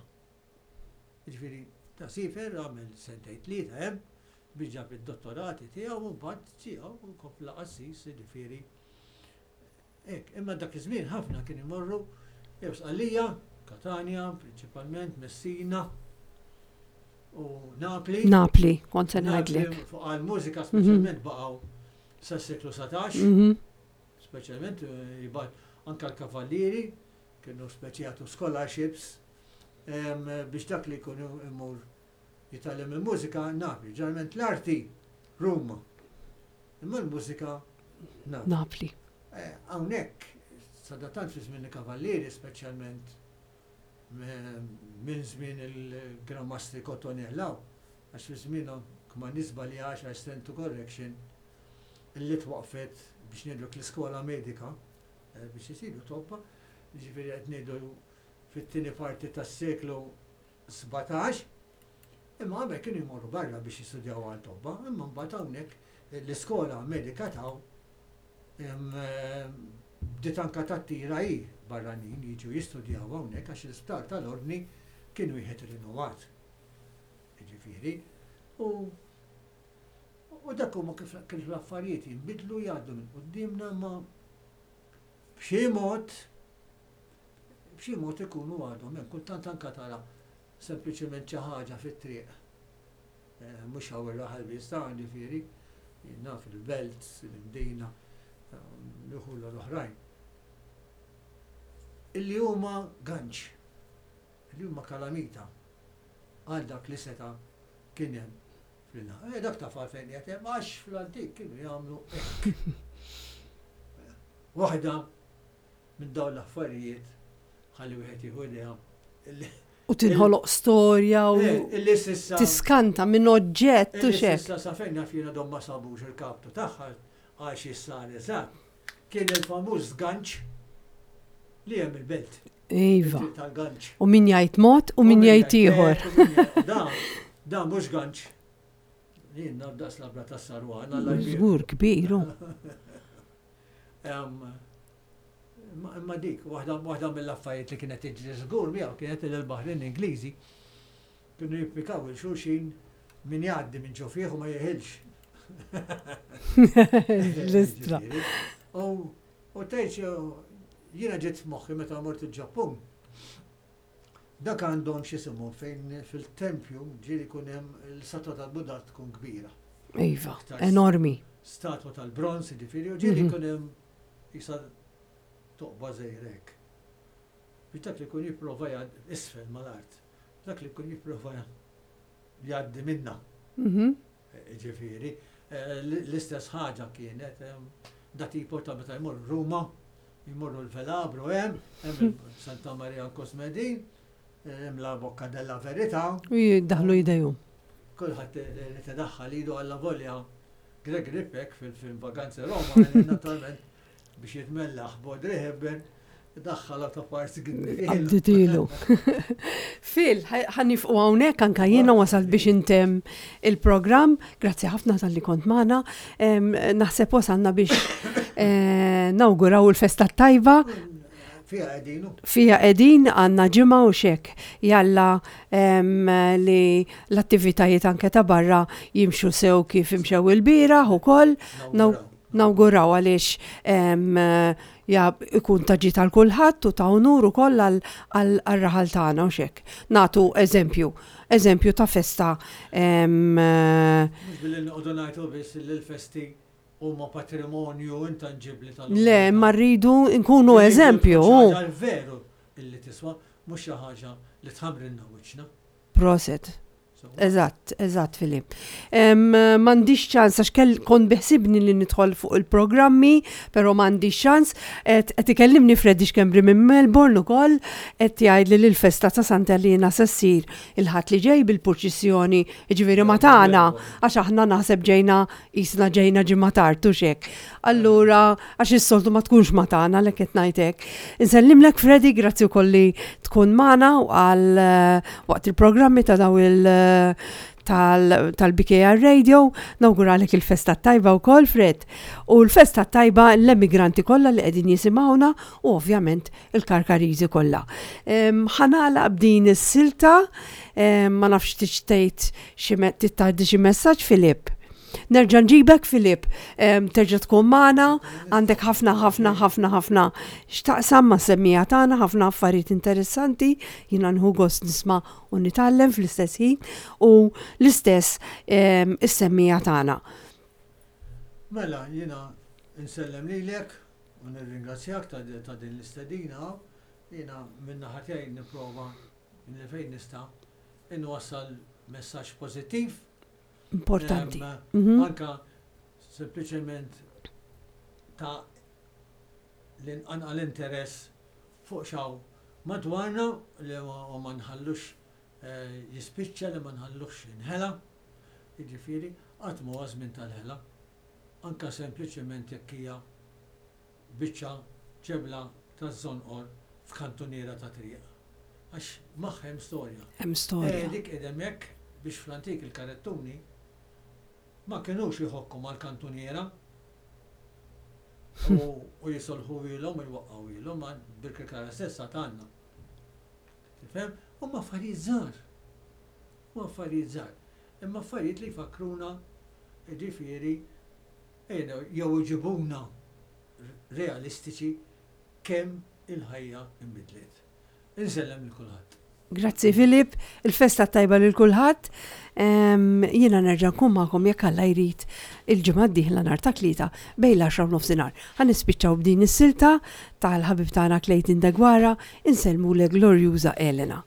Ġifieri, ta' siefer għamel sentejn tlieta hemm biex ġab id-dottorati tiegħu u mbagħad tiegħu u kompla qassis, ġifieri. Hekk, imma dak iż-żmien ħafna kien imorru jew Sqallija, Katania, prinċipalment Messina u Napli. Napli, kont se Napli ngħidlek. Fuq għal-mużika speċjalment baqgħu sas-seklu satax, Mhm. speċjalment eh, jibgħat anka l-kavallieri kienu speċi jagħtu scholarships em, biex dak li jkunu imur jitgħallem il-mużika Napli. Ġeneralment l-arti Ruma. Imma l-mużika Napli. Napli. Eh, Hawnhekk, sadattant fi żmien il-kavallieri, speċjalment me- minn żmien il-Gran Mastri Cottonellaw, għax fi żmienhom kma nisba li għax I stand to correction, illi twaqfet biex ngħidu l-iskola medika eh, biex isiru tobba, ġifieri qed ngħidu fit-tieni parti tas-seklu sbatax, imma qabel kienu jmorru barra biex jistudjaw għal tobba, imma mbagħad hawnhekk l-iskola medika taw em, em, bdiet anka tattira hi barranin jiġu jistudjaw hawnhekk għax l-isptar tal-Ordni kien wieħed rinnovat. Ġifieri, u u dak huma kif kif l-affarijiet jinbidlu jgħaddu minn quddiemna ma b'xi mod b'xi mod ikunu għadhom hemm kultant anka tara sempliċement xi ħaġa fit-triq. Eh, Mhux hawn ir-raħal biss ta' ġifieri, jien naf il-belt, il-Mdina, l l-oħrajn. Illi huma ganċ, illi huma kalamita għal dak li seta kien hemm fl Eh, dak taf għalfejn qiegħed hemm għax fl-antik kienu jagħmlu hekk. Waħda minn dawn l-affarijiet ħalli wieħed jieħu idea illi U tinħoloq storja u Eh, illi s'issa tiskanta minn oġġett u illi xek. s'issa sa fejn naf jiena dom ma sabux il-kaptu tagħha għax issa eżatt. Kien il-famuż ganċ li hemm il-belt. Iva. Il-triq tal-ganċ. U min jgħid mod u min jgħid ieħor. hekk, u min jgħid- Da, da mhux ganċ. Jien naf daqs labra tas-sarwan, Alla jbierek. Żgur kbir. hu. Em, Imma imma dik, waħda waħda mill-affarijiet li kienet tiġri żgur miegħu kienet li l-baħrin Ingliżi kienu jippikaw il xulxin min jgħaddi minn ġo fih u ma jeħilx. L-istra. Ġifieri. U u tgħid Jiena ġiet f'moħħi meta mort il-Ġappun. Dak għandhom x'isimhom fejn fil-tempju ġieli jkun hemm l-istatwa tal-Buddha tkun kbira. Iva, enormi. Statwa tal-bronz, ġifieri, u ġieli jkun hemm jisa toqba żgħira. Biex dak li jkun jipprova isfel mal-art, dak li jkun jipprova jgħaddi minna. Mhm. Ġifieri, l-istess ħaġa kienet da tipo ta' meta jmur Ruma, jmorru l-Velabro hemm, hemm Santa Maria Cosmedin, hemm la Bocca della Verità. U jiddaħlu jdejhom. Kulħadd li tedaħħal idu għalla volja Gregory Peck fil-film Vaganze Roma, naturalment biex jitmellaħ b'Audrey Hepburn, daħħala ta' parts. Għadditilu. Phil, ħa nieqfu hawnhekk, anka jiena wasalt biex intemm il-programm. Grazzi ħafna talli kont magħna. Naħseb wasalna biex eh, nawguraw il-festa tajba. Fija qegħdin. Fija qegħdin, għandna ġimgħa u xek. Jalla li l-attivitajiet anke ta' barra jimxu sew kif imxew il-bieraħ ukoll. Nawguraw għaliex ja ikun ta' ġid għal kulħadd u ta' unur ukoll għal-raħal tagħna u xek. Nagħtu eżempju, eżempju ta' festa. Mhux billi noqogħdu ngħidu biss li l-festi huma patrimonju intanġibbli tal Le, ma rridu nkunu eżempju. Veru illi tiswa, mhux xi ħaġa li tħamrinna wiċċna. Prosit. Eżatt, eżatt, Filip. M'għandix ċans, għax kell kont beħsibni li nidħol fuq il-programmi, pero m'għandix ċans. Qed ikellimni Freddy Schembri minn Melbourne ukoll, qed jgħid li l-festa ta' Santa Elena se ssir il-Ħadd li ġej bil-purċissjoni, ġifieri ma tagħna, għax aħna naħseb ġejna jisna ġejna ġimgħa tard u xek. Allura, għax is-soltu ma tkunx ma tagħna l qed ngħidlek. Insellimlek, Freddy, grazzi wkoll li tkun magħna għal waqt il-programmi ta' daw il- tal-B K R Radio, nawguralek il-festa tajba u Fred. U l-festa tajba l-emigranti kollha li qegħdin jisimgħuna u ovvjament il-Karkariżi kollha. Ħa nagħlaq b'din is-silta, ma nafx tixtejt xi tgħaddi xi messaġġ, Filip. Nerġa' nġibek, Filip, terġa' tkun magħna, għandek ħafna ħafna ħafna ħafna x'taqsam ma' semmija tagħna, ħafna affarijiet interessanti, jiena nieħu gost nisma' u nitgħallem fl-istess ħin u l-istess is-semmija tagħna. Mela, jiena insellem lilek u nirringrazzjak ta' din l-istedina. Jiena minna tiegħi nipprova li fejn nista' inwassal messaġġ pożittiv. Importanti. Mhm. Anka sempliċement ta' l-inqanqa l-interess fuq x'hawn madwarna li ma nħallux eh, jispiċċa, li ma nħallux jinħela. Jiġifieri, qatt ma żmien tal-ħela. Anka sempliċement jekk hija biċċa ġebla ta' żonqor f'kantuniera ta' triq. Għax magħha hemm storja. Hemm storja. Eh, dik hemmhekk biex fl-antik il-karettuni ma kienux jħokku mal-kantuniera u jisolħu ilhom u jwaqqgħu ilhom, ma bil-Kirkara stessa tagħna. Tifhem? Huma affarijiet żgħar. Huma affarijiet żgħar. Imma affarijiet li jfakkruna, ġifieri, jew iġibuna realistiċi kemm il-ħajja imbidlet. Insellem lil kulħadd. Grazzi, Filip, il-festa tajba lil kulħadd. Jiena nerġa' nkun magħkom jekk Alla jrid il-ġimgħa d-dieħla nhar ta' Tlieta bejn l-għaxra u nofsinhar. Ħa nispiċċaw b'din is-silta tal-ħabib tagħna Clayton Deguara, insellmu le glorjuża Elena.